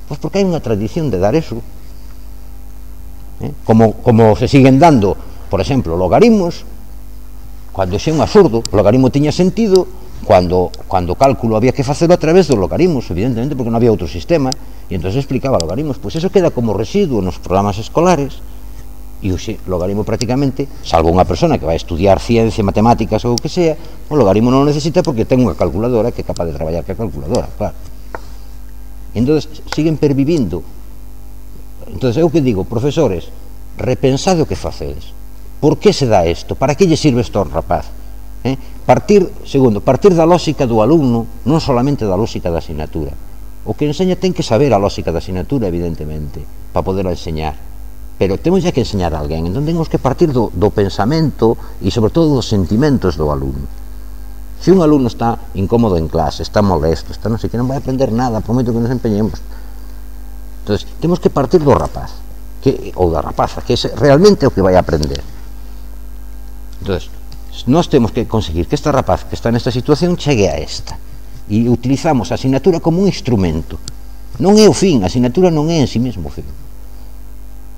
Speaker 2: Pois porque hai unha tradición de dar eso, eh? como, como se siguen dando, por exemplo, logaritmos. Cando xe é un absurdo, o logaritmo tiña sentido cando, cando o cálculo había que facelo a través dos logaritmos, evidentemente, porque non había outro sistema, e entón se explicaba logaritmos. Pois eso queda como residuo nos programas escolares, e o xe, logaritmo prácticamente, salvo unha persona que vai estudiar ciencia, matemáticas ou o que sea, o logaritmo non o necesita porque ten unha calculadora que é capaz de traballar que a calculadora, claro. E entón siguen pervivindo. Entón eu que digo, profesores, repensade o que facedes. Por que se dá isto? Para que lle sirve isto ao rapaz? Eh? Partir, segundo, partir da lógica do alumno, non solamente da lógica da asignatura. O que enseña ten que saber a lógica da asignatura, evidentemente, para poder enseñar. Pero temos ya que enseñar a alguén, entón temos que partir do, do pensamento e sobre todo dos sentimentos do alumno. Se un alumno está incómodo en clase, está molesto, está non sei que, non vai aprender nada, por moito que nos empeñemos. Entón, temos que partir do rapaz, que, ou da rapaza, que é realmente o que vai aprender. Entón, nós temos que conseguir que esta rapaz que está nesta situación chegue a esta, e utilizamos a asignatura como un instrumento. Non é o fin, a asignatura non é en si mesmo o fin.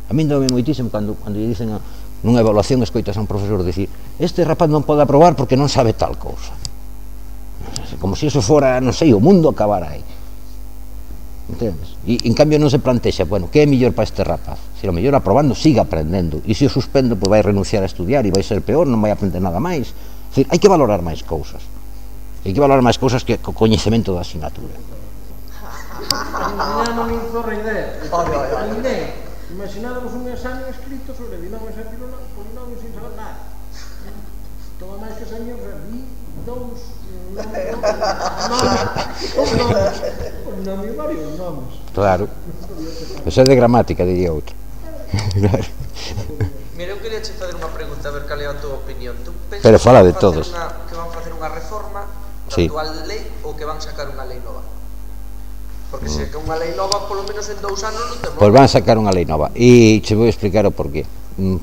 Speaker 2: A min dame moitísimo cando, cando lle dicen a, nunha evaluación, escoitas a un profesor dicir: este rapaz non pode aprobar porque non sabe tal cousa. Como se iso fora, non sei, o mundo acabara aí. Entendes? E en cambio non se plantexa, bueno, que é mellor para este rapaz? Se o mellor aprobando siga aprendendo, e se o suspendo pois vai renunciar a estudiar e vai ser peor, non vai aprender nada máis. É dicir, hai que valorar máis cousas, hai que valorar máis cousas que o coñecemento da asignatura.
Speaker 3: Non me incorre idea. Ninguén. Imaginádamos un examen escrito sobre binomios e polinomios sin saber nada. Todo máis que señor, vi dous polinomios, varios nomes.
Speaker 2: Claro. Eso é de gramática, diría outro. Claro.
Speaker 4: Mira, eu queria che fazer unha pregunta, a ver cal é a tua opinión. Tú pensas
Speaker 2: Pero fala de
Speaker 4: que,
Speaker 2: todos.
Speaker 4: Una, que van facer unha reforma da
Speaker 2: sí.
Speaker 4: actual lei ou que van sacar unha lei nova? Porque se que unha lei nova, polo menos en dous anos non temos.
Speaker 2: Pois van sacar unha lei nova. E che vou explicar o porqué.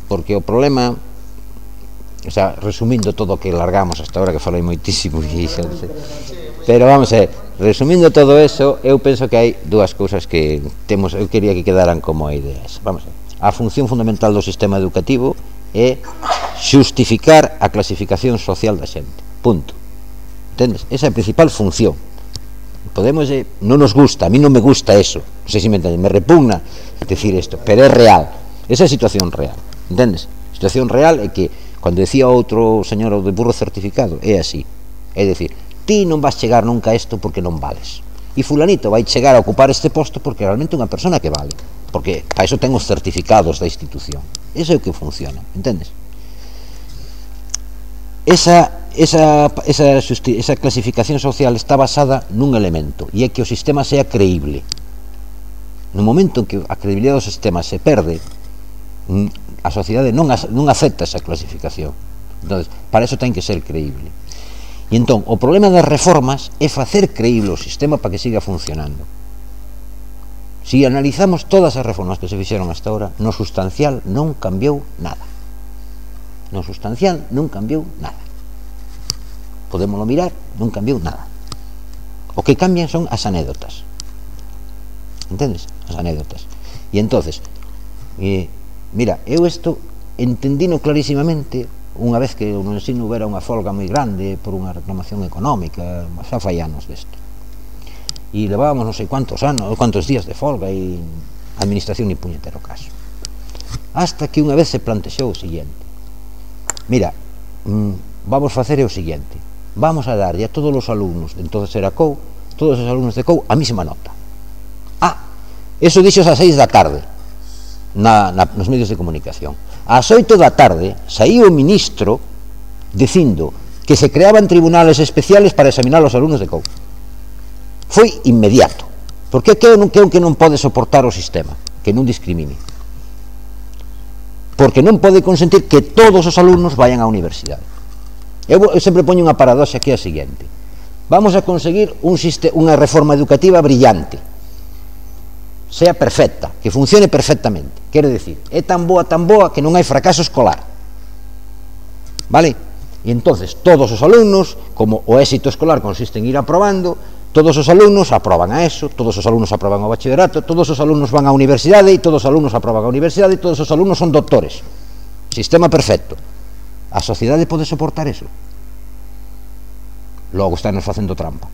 Speaker 2: Porque o problema, o sea, resumindo todo o que largamos hasta ahora, que falei moitísimo, e xa non sei. Pero vamos a ver, resumindo todo eso, eu penso que hai dúas cousas que temos, eu quería que quedaran como ideas. Vamos a ver. A función fundamental do sistema educativo é xustificar a clasificación social da xente. Punto. Entendes? Esa é a principal función. Podemos, eh, non nos gusta, a mí non me gusta eso, non sei se me entenden, me repugna decir isto, pero é real, esa é a situación real, entendes? A situación real é que, cando decía outro señor de burro certificado, é así, é dicir, ti non vas chegar nunca a isto porque non vales, e fulanito vai chegar a ocupar este posto porque realmente é unha persona que vale, porque para iso ten os certificados da institución, eso é o que funciona, entendes? esa, esa, esa, esa clasificación social está basada nun elemento, e é que o sistema sea creíble. No momento en que a credibilidade do sistema se perde, a sociedade non, non acepta esa clasificación. Entón, para eso ten que ser creíble. E entón, o problema das reformas é facer creíble o sistema para que siga funcionando. Si analizamos todas as reformas que se fixeron hasta ahora, no sustancial non cambiou nada. No sustancial non cambiou nada. Podémoslo mirar, non cambiou nada. O que cambian son as anécdotas. Entendes? As anécdotas. E entonces, eh, mira, eu isto entendino clarísimamente unha vez que no ensino hubiera unha folga moi grande por unha reclamación económica, xa fai anos desto. E levábamos non sei cuántos anos, cuántos días de folga e a administración ni puñetero caso. Hasta que unha vez se plantexou o seguinte: mira, mmm, vamos facer o seguinte, vamos a darlle a todos os alumnos de entonces era C O U, todos os alumnos de C O U a mesma nota. Ah, eso dixos ás seis da tarde na, na, nos medios de comunicación. Ás oito da tarde saíu o ministro dicindo que se creaban tribunales especiales para examinar os alumnos de C O U. Foi inmediato, porque que non, que que non pode soportar o sistema, que non discrimine, porque non pode consentir que todos os alumnos vayan á universidade. Eu, eu sempre poño unha paradoxa que é a seguinte: vamos a conseguir un unha reforma educativa brillante, sea perfecta, que funcione perfectamente, quero dicir, é tan boa, tan boa que non hai fracaso escolar, vale? E entonces todos os alumnos, como o éxito escolar consiste en ir aprobando, todos os alumnos aproban a ESO, todos os alumnos aproban o bachillerato, todos os alumnos van á universidade e todos os alumnos aproban a universidade e todos os alumnos son doctores. Sistema perfecto. A sociedade pode soportar eso? Logo estános facendo trampa.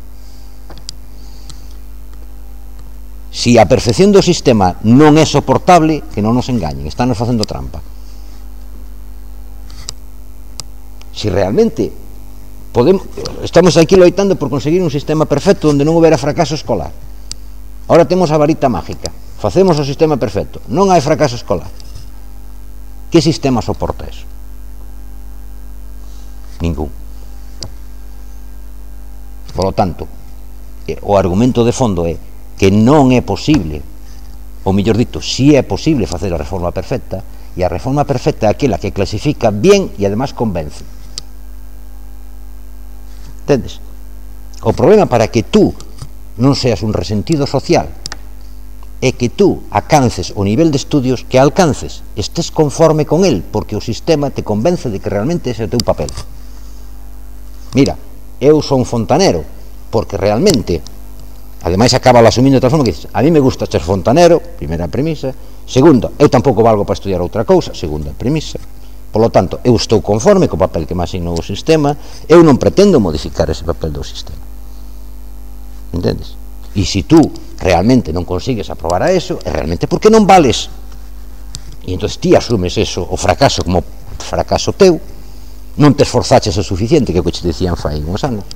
Speaker 2: Si a perfección do sistema non é soportable, que non nos engañen, estános facendo trampa. Si realmente podemos, estamos aquí loitando por conseguir un sistema perfecto onde non houbera fracaso escolar, ahora temos a varita mágica, facemos o sistema perfecto, non hai fracaso escolar, que sistema soporta eso? Ningún. Por lo tanto, o argumento de fondo é que non é posible, ou mellor dito, si é posible facer a reforma perfecta, e a reforma perfecta é aquela que clasifica bien e además convence. Entendes? O problema para que tú non seas un resentido social é que tú alcances o nivel de estudios que alcances, estés conforme con el, porque o sistema te convence de que realmente ese é o teu papel. Mira, eu son fontanero porque realmente, ademais acaba asumindo de tal forma que dices, a mí me gusta ser fontanero, primeira premisa. Segunda, eu tampouco valgo para estudiar outra cousa, segunda premisa. Por lo tanto, eu estou conforme co papel que me asignou o sistema, eu non pretendo modificar ese papel do sistema. Entendes? E se tú realmente non consigues aprobar a eso, é realmente porque non vales. E entón ti asumes eso, o fracaso como fracaso teu, non te esforzaches o suficiente, que é o que te dicían fai uns anos,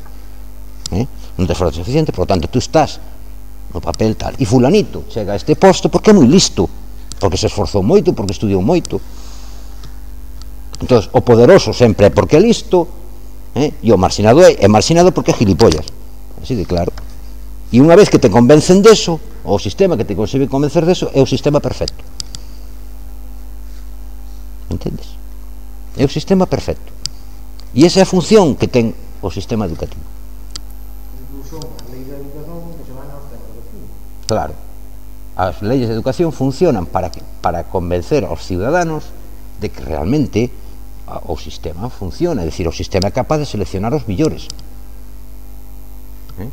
Speaker 2: eh? non te esforzaches o suficiente, por lo tanto, tú estás no papel tal, e fulanito chega a este posto porque é moi listo, porque se esforzou moito, porque estudiou moito. Entón, o poderoso sempre é porque é listo, eh? e o marxinado é, é marxinado porque é gilipollas, así de claro. E unha vez que te convencen deso, o sistema que te consigue convencer deso é o sistema perfecto. Entendes? É o sistema perfecto. E esa é a función que ten o sistema educativo.
Speaker 3: Incluso a lei de educación que se van aos tempos de fin.
Speaker 2: Claro. As leyes de educación funcionan para, que, para convencer aos ciudadanos de que realmente o sistema funciona, é dicir, o sistema é capaz de seleccionar os millores. Eh?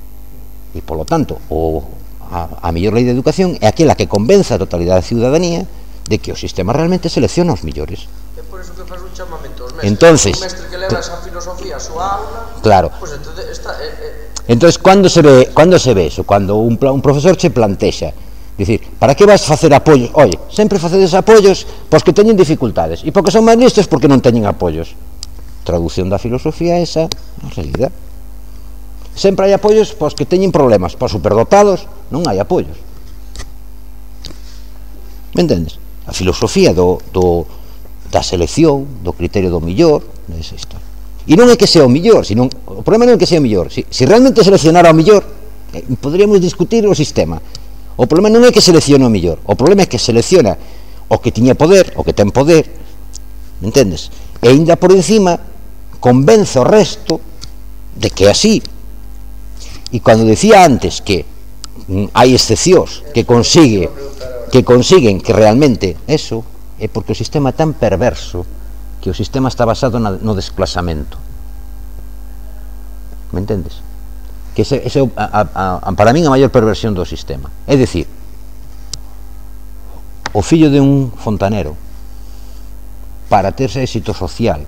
Speaker 2: E, polo tanto, o, a, a mellor lei de educación é aquela que convence a totalidade da ciudadanía de que o sistema realmente selecciona os millores.
Speaker 4: É por eso que faz un chamamento aos mestres.
Speaker 2: Entonces,
Speaker 4: un mestre que leva esa filosofía a súa aula,
Speaker 2: claro.
Speaker 4: Pues entonces está, eh, eh.
Speaker 2: Entonces, cando se ve, cando se ve eso? Cando un, un profesor che plantexa, dicir, para que vas facer apoios? Oye, sempre facedes apoios pois que teñen dificultades, e porque son máis listos porque non teñen apoios. Traducción da filosofía esa, na realidad. Sempre hai apoios pois que teñen problemas, pois superdotados non hai apoios. Me entendes? A filosofía do, do, da selección, do criterio do millor, esa historia. E non é que sea o millor, sino, o problema non é que sea o millor. Se, se realmente seleccionara o millor, eh, poderíamos discutir o sistema. O problema non é que seleccione o millor, o problema é que selecciona o que tiña poder, o que ten poder, me entendes? E ainda por encima convence o resto de que é así. E cando decía antes que mm, hai excepcións que consigue que consiguen que realmente eso, é porque o sistema é tan perverso que o sistema está basado na, no desplazamento. Me entendes? Que ese, ese a, a, a, para min a maior perversión do sistema. É dicir, o fillo de un fontanero, para terse éxito social,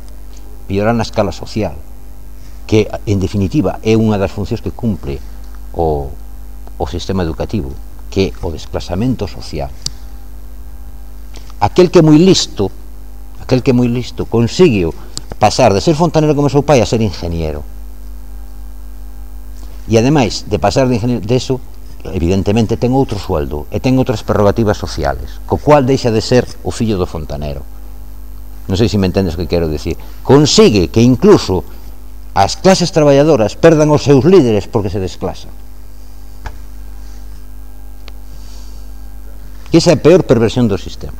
Speaker 2: piorar na escala social, que en definitiva é unha das funcións que cumpre o, o sistema educativo, que é o desplazamento social. Aquel que é moi listo, aquel que é moi listo, consigue pasar de ser fontanero como seu pai a ser ingeniero. E ademais de pasar de ingeniero de eso, evidentemente ten outro sueldo e ten outras prerrogativas sociales, co cual deixa de ser o fillo do fontanero. Non sei se me entendes o que quero decir. Consigue que incluso as clases traballadoras perdan os seus líderes porque se desclasan. Que esa é a peor perversión do sistema.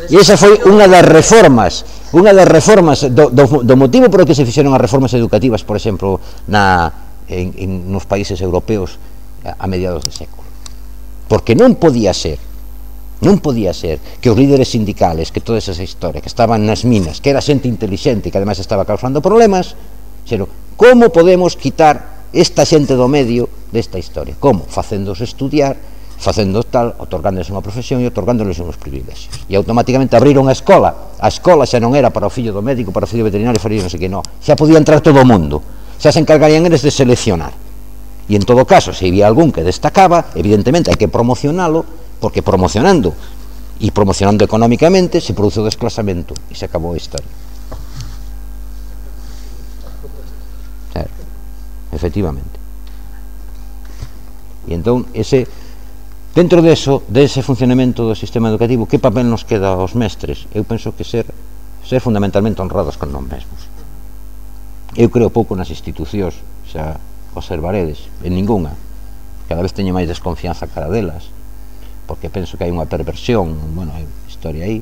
Speaker 2: E esa foi unha das reformas, unha das reformas do, do, do motivo por que se fixeron as reformas educativas, por exemplo, na, en, en, nos países europeos a, a mediados de século. Porque non podía ser, non podía ser que os líderes sindicales, que toda esa historia, que estaban nas minas, que era xente inteligente, que ademais estaba causando problemas, xero, como podemos quitar esta xente do medio desta historia? Como? Facéndose estudiar, facendo tal, otorgándoles unha profesión e otorgándoles uns privilegios. E automáticamente abriron a escola. A escola xa non era para o fillo do médico, para o fillo veterinario, para o non sei que, non. Xa podía entrar todo o mundo. Xa se encargarían eles de seleccionar. E en todo caso, se había algún que destacaba, evidentemente hai que promocionalo, porque promocionando e promocionando económicamente se produce o desclasamento e se acabou a historia. Claro, efectivamente. E entón, ese... Dentro deso, dese funcionamento do sistema educativo, que papel nos queda aos mestres? Eu penso que ser, ser fundamentalmente honrados con nós mesmos. Eu creo pouco nas institucións, xa observaredes, en ninguna. Cada vez teño máis desconfianza cara delas, porque penso que hai unha perversión, bueno, hai historia aí,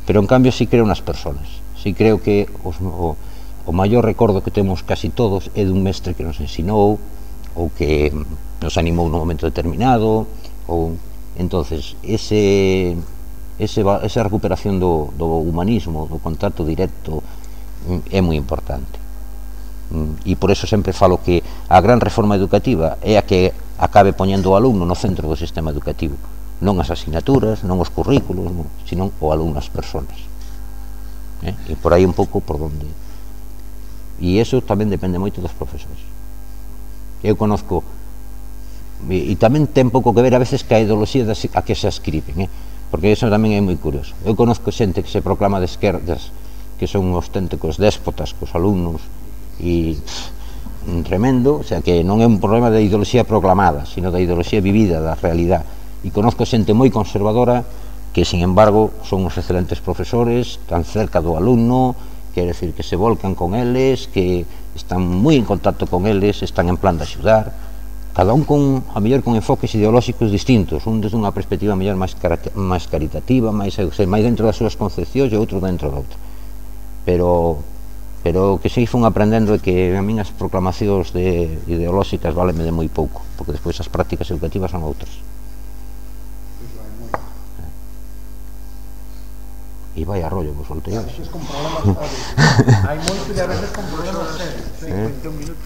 Speaker 2: pero en cambio sí creo nas persoas. Sí creo que os, o, o maior recordo que temos casi todos é dun mestre que nos ensinou, ou que nos animou nun momento determinado, ou entonces ese, ese esa recuperación do, do humanismo, do contacto directo é moi importante, e por eso sempre falo que a gran reforma educativa é a que acabe poñendo o alumno no centro do sistema educativo, non as asignaturas, non os currículos, non, sino o alumno, as persoas, eh? E por aí un pouco por donde, e iso tamén depende moito dos profesores. Eu conozco, e tamén ten pouco que ver a veces que a ideoloxía a que se ascriben, eh? Porque iso tamén é moi curioso. Eu conozco xente que se proclama de esquerdas, que son auténticos déspotas cos alumnos e pff, tremendo, o sea que non é un problema de ideoloxía proclamada, sino da ideoloxía vivida, da realidade. E conozco xente moi conservadora que, sin embargo, son uns excelentes profesores, tan cerca do alumno, quer decir que se volcan con eles, que están moi en contacto con eles, están en plan de axudar, cada un con, a mellor con enfoques ideolóxicos distintos, un desde unha perspectiva mellor máis, máis caritativa, máis, máis dentro das súas concepcións e outro dentro da outra, pero pero que se fun aprendendo é que a min as proclamacións de ideolóxicas valenme de moi pouco, porque despois as prácticas educativas son outras. E vai a rollo vos soltei hoxe.
Speaker 3: Hai moito de a veces con problemas serios.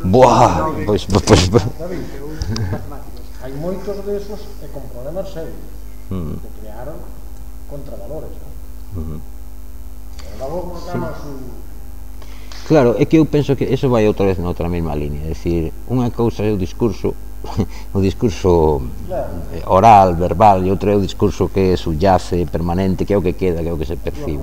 Speaker 2: Buah, pois pois
Speaker 3: hai moitos desos e con problemas serios que crearon contravalores, non? Pero logo volcamos su...
Speaker 2: Claro, é que eu penso que eso vai outra vez na outra mesma línea, é dicir, unha cousa é o discurso o discurso oral, verbal, e outro é o discurso que subyace, permanente, que é o que queda, que é o que se percibe.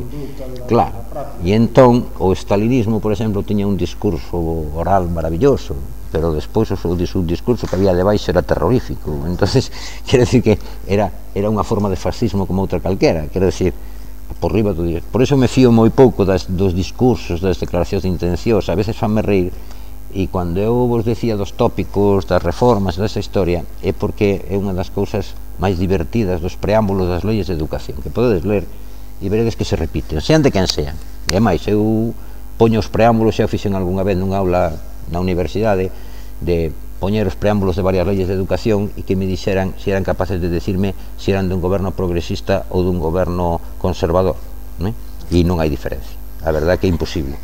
Speaker 2: Claro, e entón o stalinismo, por exemplo, tiña un discurso oral maravilloso, pero despois o seu discurso que había debaixo era terrorífico. Entonces, quero decir que era, era unha forma de fascismo como outra calquera, quero decir, por riba do día. Por iso me fío moi pouco das, dos discursos, das declaracións de intencións, a veces fanme reír, e cando eu vos decía dos tópicos, das reformas, desa historia, é porque é unha das cousas máis divertidas dos preámbulos das leyes de educación, que podedes ler e veredes que se repiten, sean de quen sean. E máis, eu poño os preámbulos, xa o fixen algunha vez nunha aula na universidade, de poñer os preámbulos de varias leyes de educación e que me dixeran se eran capaces de decirme se eran dun goberno progresista ou dun goberno conservador, né? E non hai diferencia, a verdade que é imposible.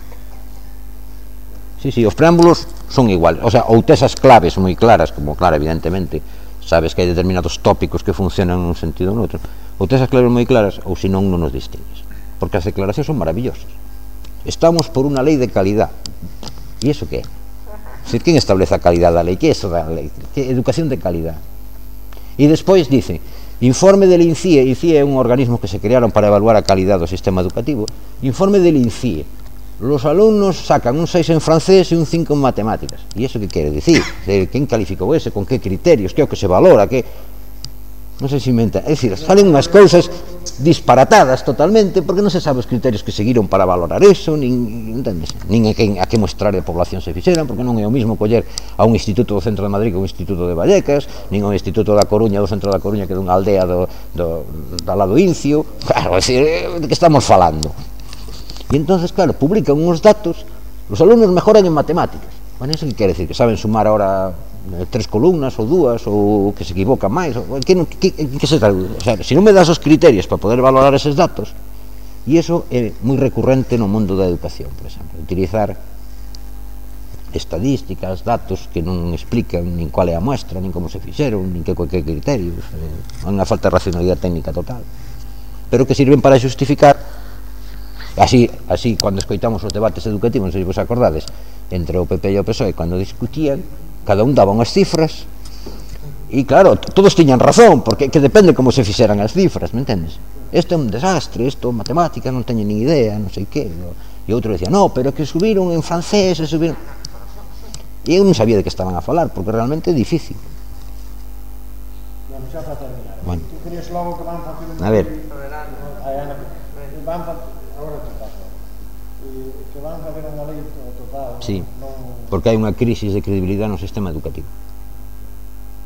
Speaker 2: Sí, sí, os preámbulos son iguales, o sea, ou tes as claves moi claras, como claro, evidentemente, sabes que hai determinados tópicos que funcionan nun sentido ou noutro, ou tes as claves moi claras, ou senón non nos distingues, porque as declaracións son maravillosas. Estamos por unha lei de calidad, e iso que é? Quen establece a calidad da lei? Que é eso da lei? Que educación de calidad? E despois dice, informe del INCIE, INCIE é un organismo que se crearon para evaluar a calidad do sistema educativo, informe del INCIE, los alumnos sacan un seis en francés e un cinco en matemáticas. E iso que quere dicir? Quen calificou ese? Con que criterios? Que é o que se valora? Que... non sei se inventa, é dicir, salen unhas cousas disparatadas totalmente, porque non se sabe os criterios que seguiron para valorar eso, nin, entendes? Nin a que, a que mostrar de población se fixeran, porque non é o mismo coller a un instituto do centro de Madrid que un instituto de Vallecas, nin a un instituto da Coruña do centro da Coruña que dunha aldea do, do, do lado Incio, claro, é dicir, de que estamos falando? E entonces, claro, publican uns datos, os alumnos mejoran en matemáticas. Bueno, iso que quere dicir? Que saben sumar ahora tres columnas ou dúas, ou que se equivocan máis, ou que, que, que se traduce? O sea, se non me das os criterios para poder valorar eses datos, e iso é moi recurrente no mundo da educación, por exemplo, utilizar estadísticas, datos que non explican nin cual é a muestra, nin como se fixeron, nin que, que criterios, é unha falta de racionalidade técnica total, pero que sirven para justificar. Así, así cando escoitamos os debates educativos, non sei se vos acordades, entre o P P e o P S O E, cando discutían, cada un daba unhas cifras e claro, todos tiñan razón, porque que depende como se fixeran as cifras, me entendes? Isto é un desastre, isto matemática non teño nin idea, non sei que, e outro decía, no, pero que subiron en francés, e subiron... E eu non sabía de que estaban a falar, porque realmente é difícil.
Speaker 3: Bueno, xa para terminar.
Speaker 2: Bueno.
Speaker 3: Tú querías logo que van facer un...
Speaker 2: A ver.
Speaker 3: Van facer... Agora te paso. Que van facer unha lei total.
Speaker 2: Sí,
Speaker 3: non...
Speaker 2: porque hai unha crisis de credibilidade no sistema educativo.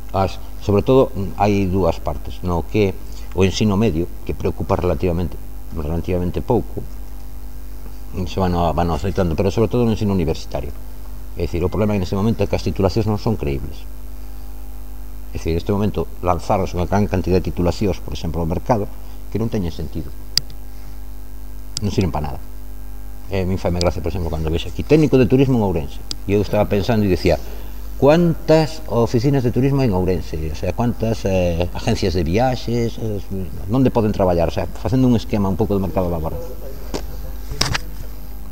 Speaker 2: As, sobre todo, hai dúas partes, no que o ensino medio, que preocupa relativamente relativamente pouco, se van, van aceitando, pero sobre todo no ensino universitario. É dicir, o problema neste momento é que as titulacións non son creíbles. É dicir, neste momento lanzaros unha gran cantidad de titulacións, por exemplo, ao mercado, que non teñen sentido. Non sirven para nada. Eh, a mí faime gracia, por exemplo, cando vexo aquí técnico de turismo en Ourense, e eu estaba pensando e dicía, cuántas oficinas de turismo hai en Ourense, o sea, cuántas eh, agencias de viaxes, eh, onde poden traballar, o sea, facendo un esquema un pouco do mercado laboral.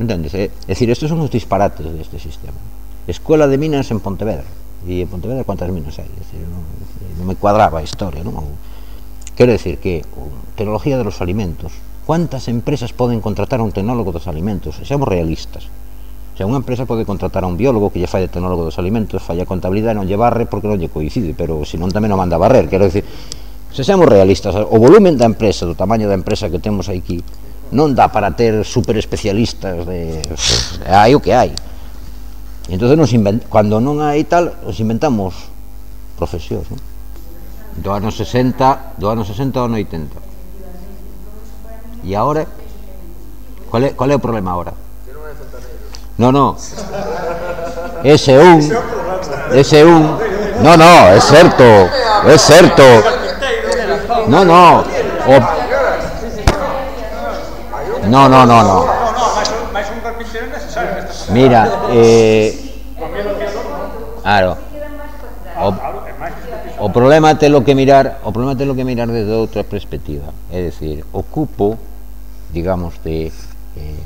Speaker 2: Entendes? É eh? dicir, estes son os disparates deste sistema. Escuela de minas en Pontevedra, e en Pontevedra cuántas minas hai? Decir, non, non me cuadraba a historia, non? Quero decir que tecnología de los alimentos, cuántas empresas poden contratar a un tecnólogo dos alimentos? Seamos realistas. O sea, unha empresa pode contratar a un biólogo que lle fai de tecnólogo dos alimentos, fai a contabilidade, non lle barre porque non lle coincide, pero senón tamén non manda a barrer. Quero dicir, se seamos realistas, o volumen da empresa, do tamaño da empresa que temos aquí, non dá para ter super especialistas de... hai o que hai. E entón, nos invent... cando non hai tal, nos inventamos profesións, non? Do ano sesenta, do ano sesenta ao ano oitenta. E agora, qual é, qual é o problema agora?
Speaker 4: Que non é fontaneiro.
Speaker 2: No, no. Ese un, ese un. No, no, é certo, é certo. No, no. O... No, no, no, no. Mira, eh... claro. O, o problema telo que mirar, o problema telo que mirar desde outra perspectiva. É dicir, o cupo, digamos, de eh,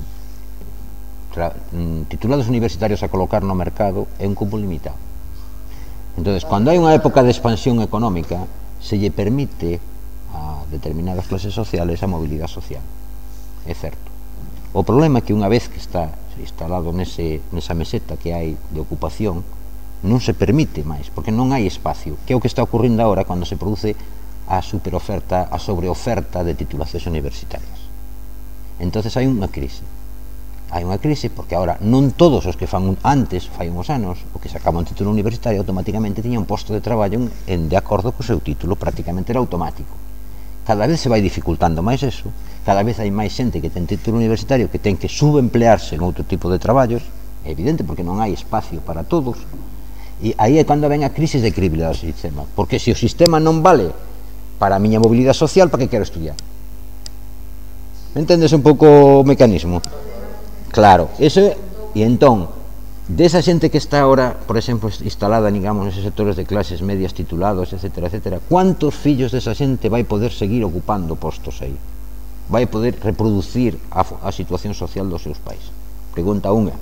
Speaker 2: tra, mm, titulados universitarios a colocar no mercado é un cupo limitado. Entonces, cando hai unha época de expansión económica, se lle permite a determinadas clases sociales a mobilidade social. É certo. O problema é que unha vez que está instalado nese, nesa meseta que hai de ocupación, non se permite máis, porque non hai espacio, que é o que está ocurrindo agora cando se produce a superoferta, a sobreoferta de titulacións universitarias. Entonces hai unha crise. Hai unha crise porque agora non todos os que fan antes, fai uns anos, o que sacaban un título universitario automáticamente tiña un posto de traballo en, de acordo co seu título, prácticamente era automático. Cada vez se vai dificultando máis eso, cada vez hai máis xente que ten título universitario que ten que subemplearse en outro tipo de traballos, é evidente porque non hai espacio para todos, e aí é cando ven a crise de credibilidade do sistema, porque se o sistema non vale para a miña mobilidade social, para que quero estudiar? Entendes un pouco o mecanismo? Claro, eso, e entón, desa xente que está ahora, por exemplo, instalada, digamos, neses sectores de clases medias titulados, etcétera, etcétera, cuántos fillos desa xente vai poder seguir ocupando postos aí? Vai poder reproducir a, a situación social dos seus pais? Pregunta unha,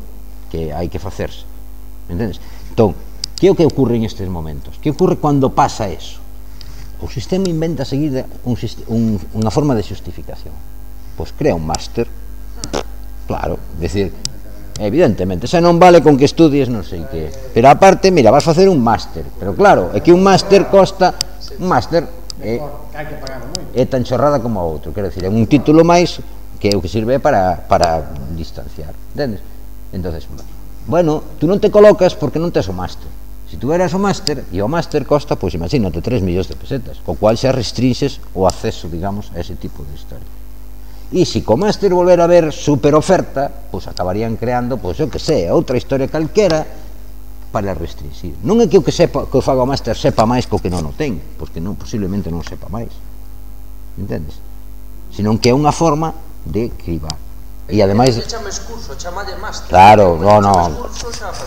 Speaker 2: que hai que facerse, entendes? Entón, que é o que ocurre en estes momentos? Que ocurre cando pasa eso? O sistema inventa seguir un, un, unha forma de justificación. Pois crea un máster. Claro, decir, evidentemente, xa non vale con que estudies non sei que, pero aparte, mira, vas facer un máster, pero claro, é que un máster costa, un máster é, é tan chorrada como a outro, quero dicir, é un título máis que é o que sirve para, para distanciar, entendes? Entonces, bueno, tú non te colocas porque non tes o máster. Se tú eras o máster, e o máster costa, pois imagínate, tres millóns de pesetas, co cual xa restringes o acceso, digamos, a ese tipo de historia. E se co máster volver a ver super oferta, pois acabarían creando, pois eu que sei, outra historia calquera para restringir. Non é que o que sepa, que o faga o máster sepa máis co que non o ten, porque non, posiblemente non sepa máis, entendes? Senón que é unha forma de cribar. E ademais, claro, no, no,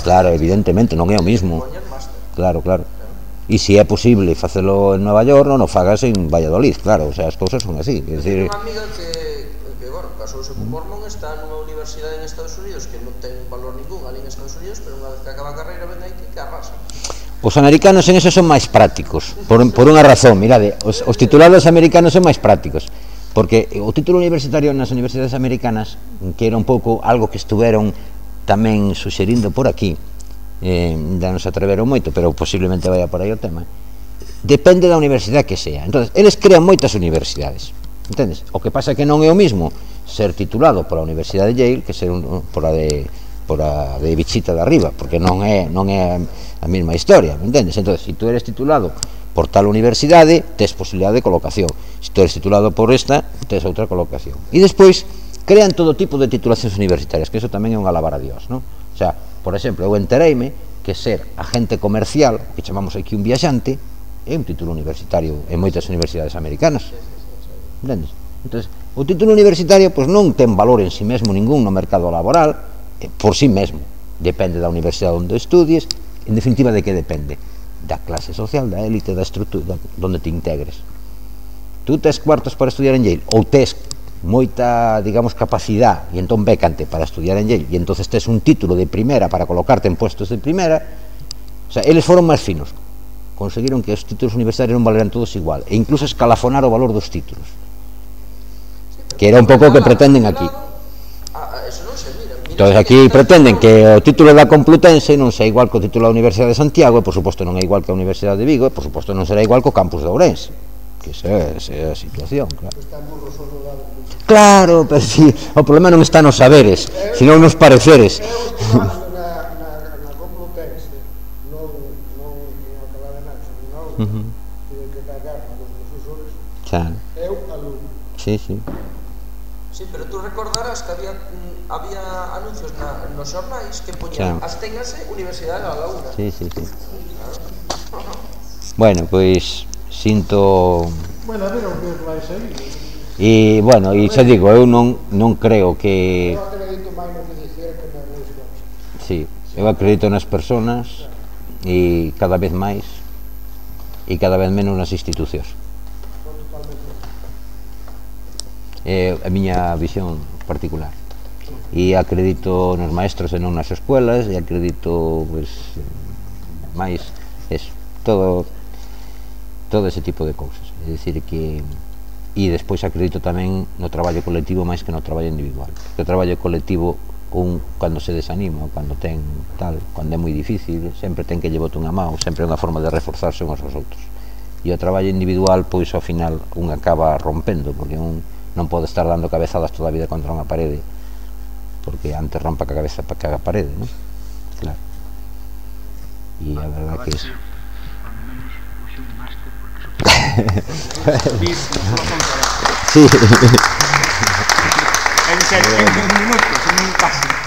Speaker 2: claro, evidentemente non é o mismo, claro, claro. E se é posible facelo en Nova York, non o fagas en Valladolid, claro, o sea, as cousas son así.
Speaker 4: É dicir, unha amiga que casouse con mormón, está nunha universidade en Estados Unidos que non ten valor ningún ali en Estados Unidos, pero unha vez que acaba a carreira ven aquí que arrasa.
Speaker 2: Os americanos en eso son máis prácticos, por, por unha razón, mirade, os, os titulados americanos son máis prácticos, porque o título universitario nas universidades americanas, que era un pouco algo que estuveron tamén suxerindo por aquí, eh, da non se atreveron moito, pero posiblemente vaya por aí o tema, depende da universidade que sea. Entón, eles crean moitas universidades, entendes? O que pasa é que non é o mismo ser titulado pola Universidade de Yale que ser un, por a de por a de bichita de arriba, porque non é non é a mesma historia, me entendes? Entón, se tú eres titulado por tal universidade, tes posibilidade de colocación. Se tú eres titulado por esta, tes outra colocación. E despois crean todo tipo de titulacións universitarias, que eso tamén é un alabar a Dios, non? O sea, por exemplo, eu entereime que ser agente comercial, que chamamos aquí un viaxante, é un título universitario en moitas universidades americanas, entendes? Entón, o título universitario pois non ten valor en si mesmo ningún no mercado laboral, eh, por si mesmo, depende da universidade onde estudies, en definitiva de que depende? Da clase social, da élite, da estrutura onde te integres. Tú tes cuartos para estudiar en Yale, ou tes moita, digamos, capacidade, e entón bécante para estudiar en Yale, e entonces tes un título de primeira para colocarte en puestos de primeira, o sea, eles foron máis finos, conseguiron que os títulos universitarios non valeran todos igual, e incluso escalafonar o valor dos títulos, que era un pouco o que pretenden aquí. Entón, aquí pretenden que o título da Complutense non sea igual que o título da Universidade de Santiago, e por suposto non é igual que a Universidade de Vigo, e por suposto non será igual que o campus de Ourense, que esa é a situación, claro. Claro, pero si, o problema non está nos saberes, sino nos pareceres.
Speaker 3: Na Complutense non acababa nada, non tive que cargar nos profesores, eu alumno.
Speaker 2: Sí, sí.
Speaker 4: Sí, pero tú recordarás que había había anuncios na, nos xornais que poñían as téngase Universidade da Laguna.
Speaker 2: Sí, sí, sí. Bueno, pois sinto...
Speaker 3: Bueno, a ver o que vai seguir.
Speaker 2: E, bueno, e xa digo, eu non, non creo que...
Speaker 3: Eu acredito máis no que dicir que nas religións.
Speaker 2: Sí, eu acredito nas persoas e cada vez máis e cada vez menos nas institucións. É a miña visión particular. E acredito nos maestros e non nas escuelas, e acredito, pois, máis, eso, todo, todo ese tipo de cousas. É dicir que... E despois acredito tamén no traballo colectivo máis que no traballo individual. Porque o traballo colectivo, un, cando se desanima, cando ten tal, cando é moi difícil, sempre ten que llevote unha mão, sempre é unha forma de reforzarse uns aos outros. e o traballo individual, pois ao final un acaba rompendo, porque un non pode estar dando cabezadas toda a vida contra unha parede, porque antes rompa a cabeza para que a parede, non? Claro. E a verdade que iso. Sí.
Speaker 1: En serio, en un minuto, en un paso.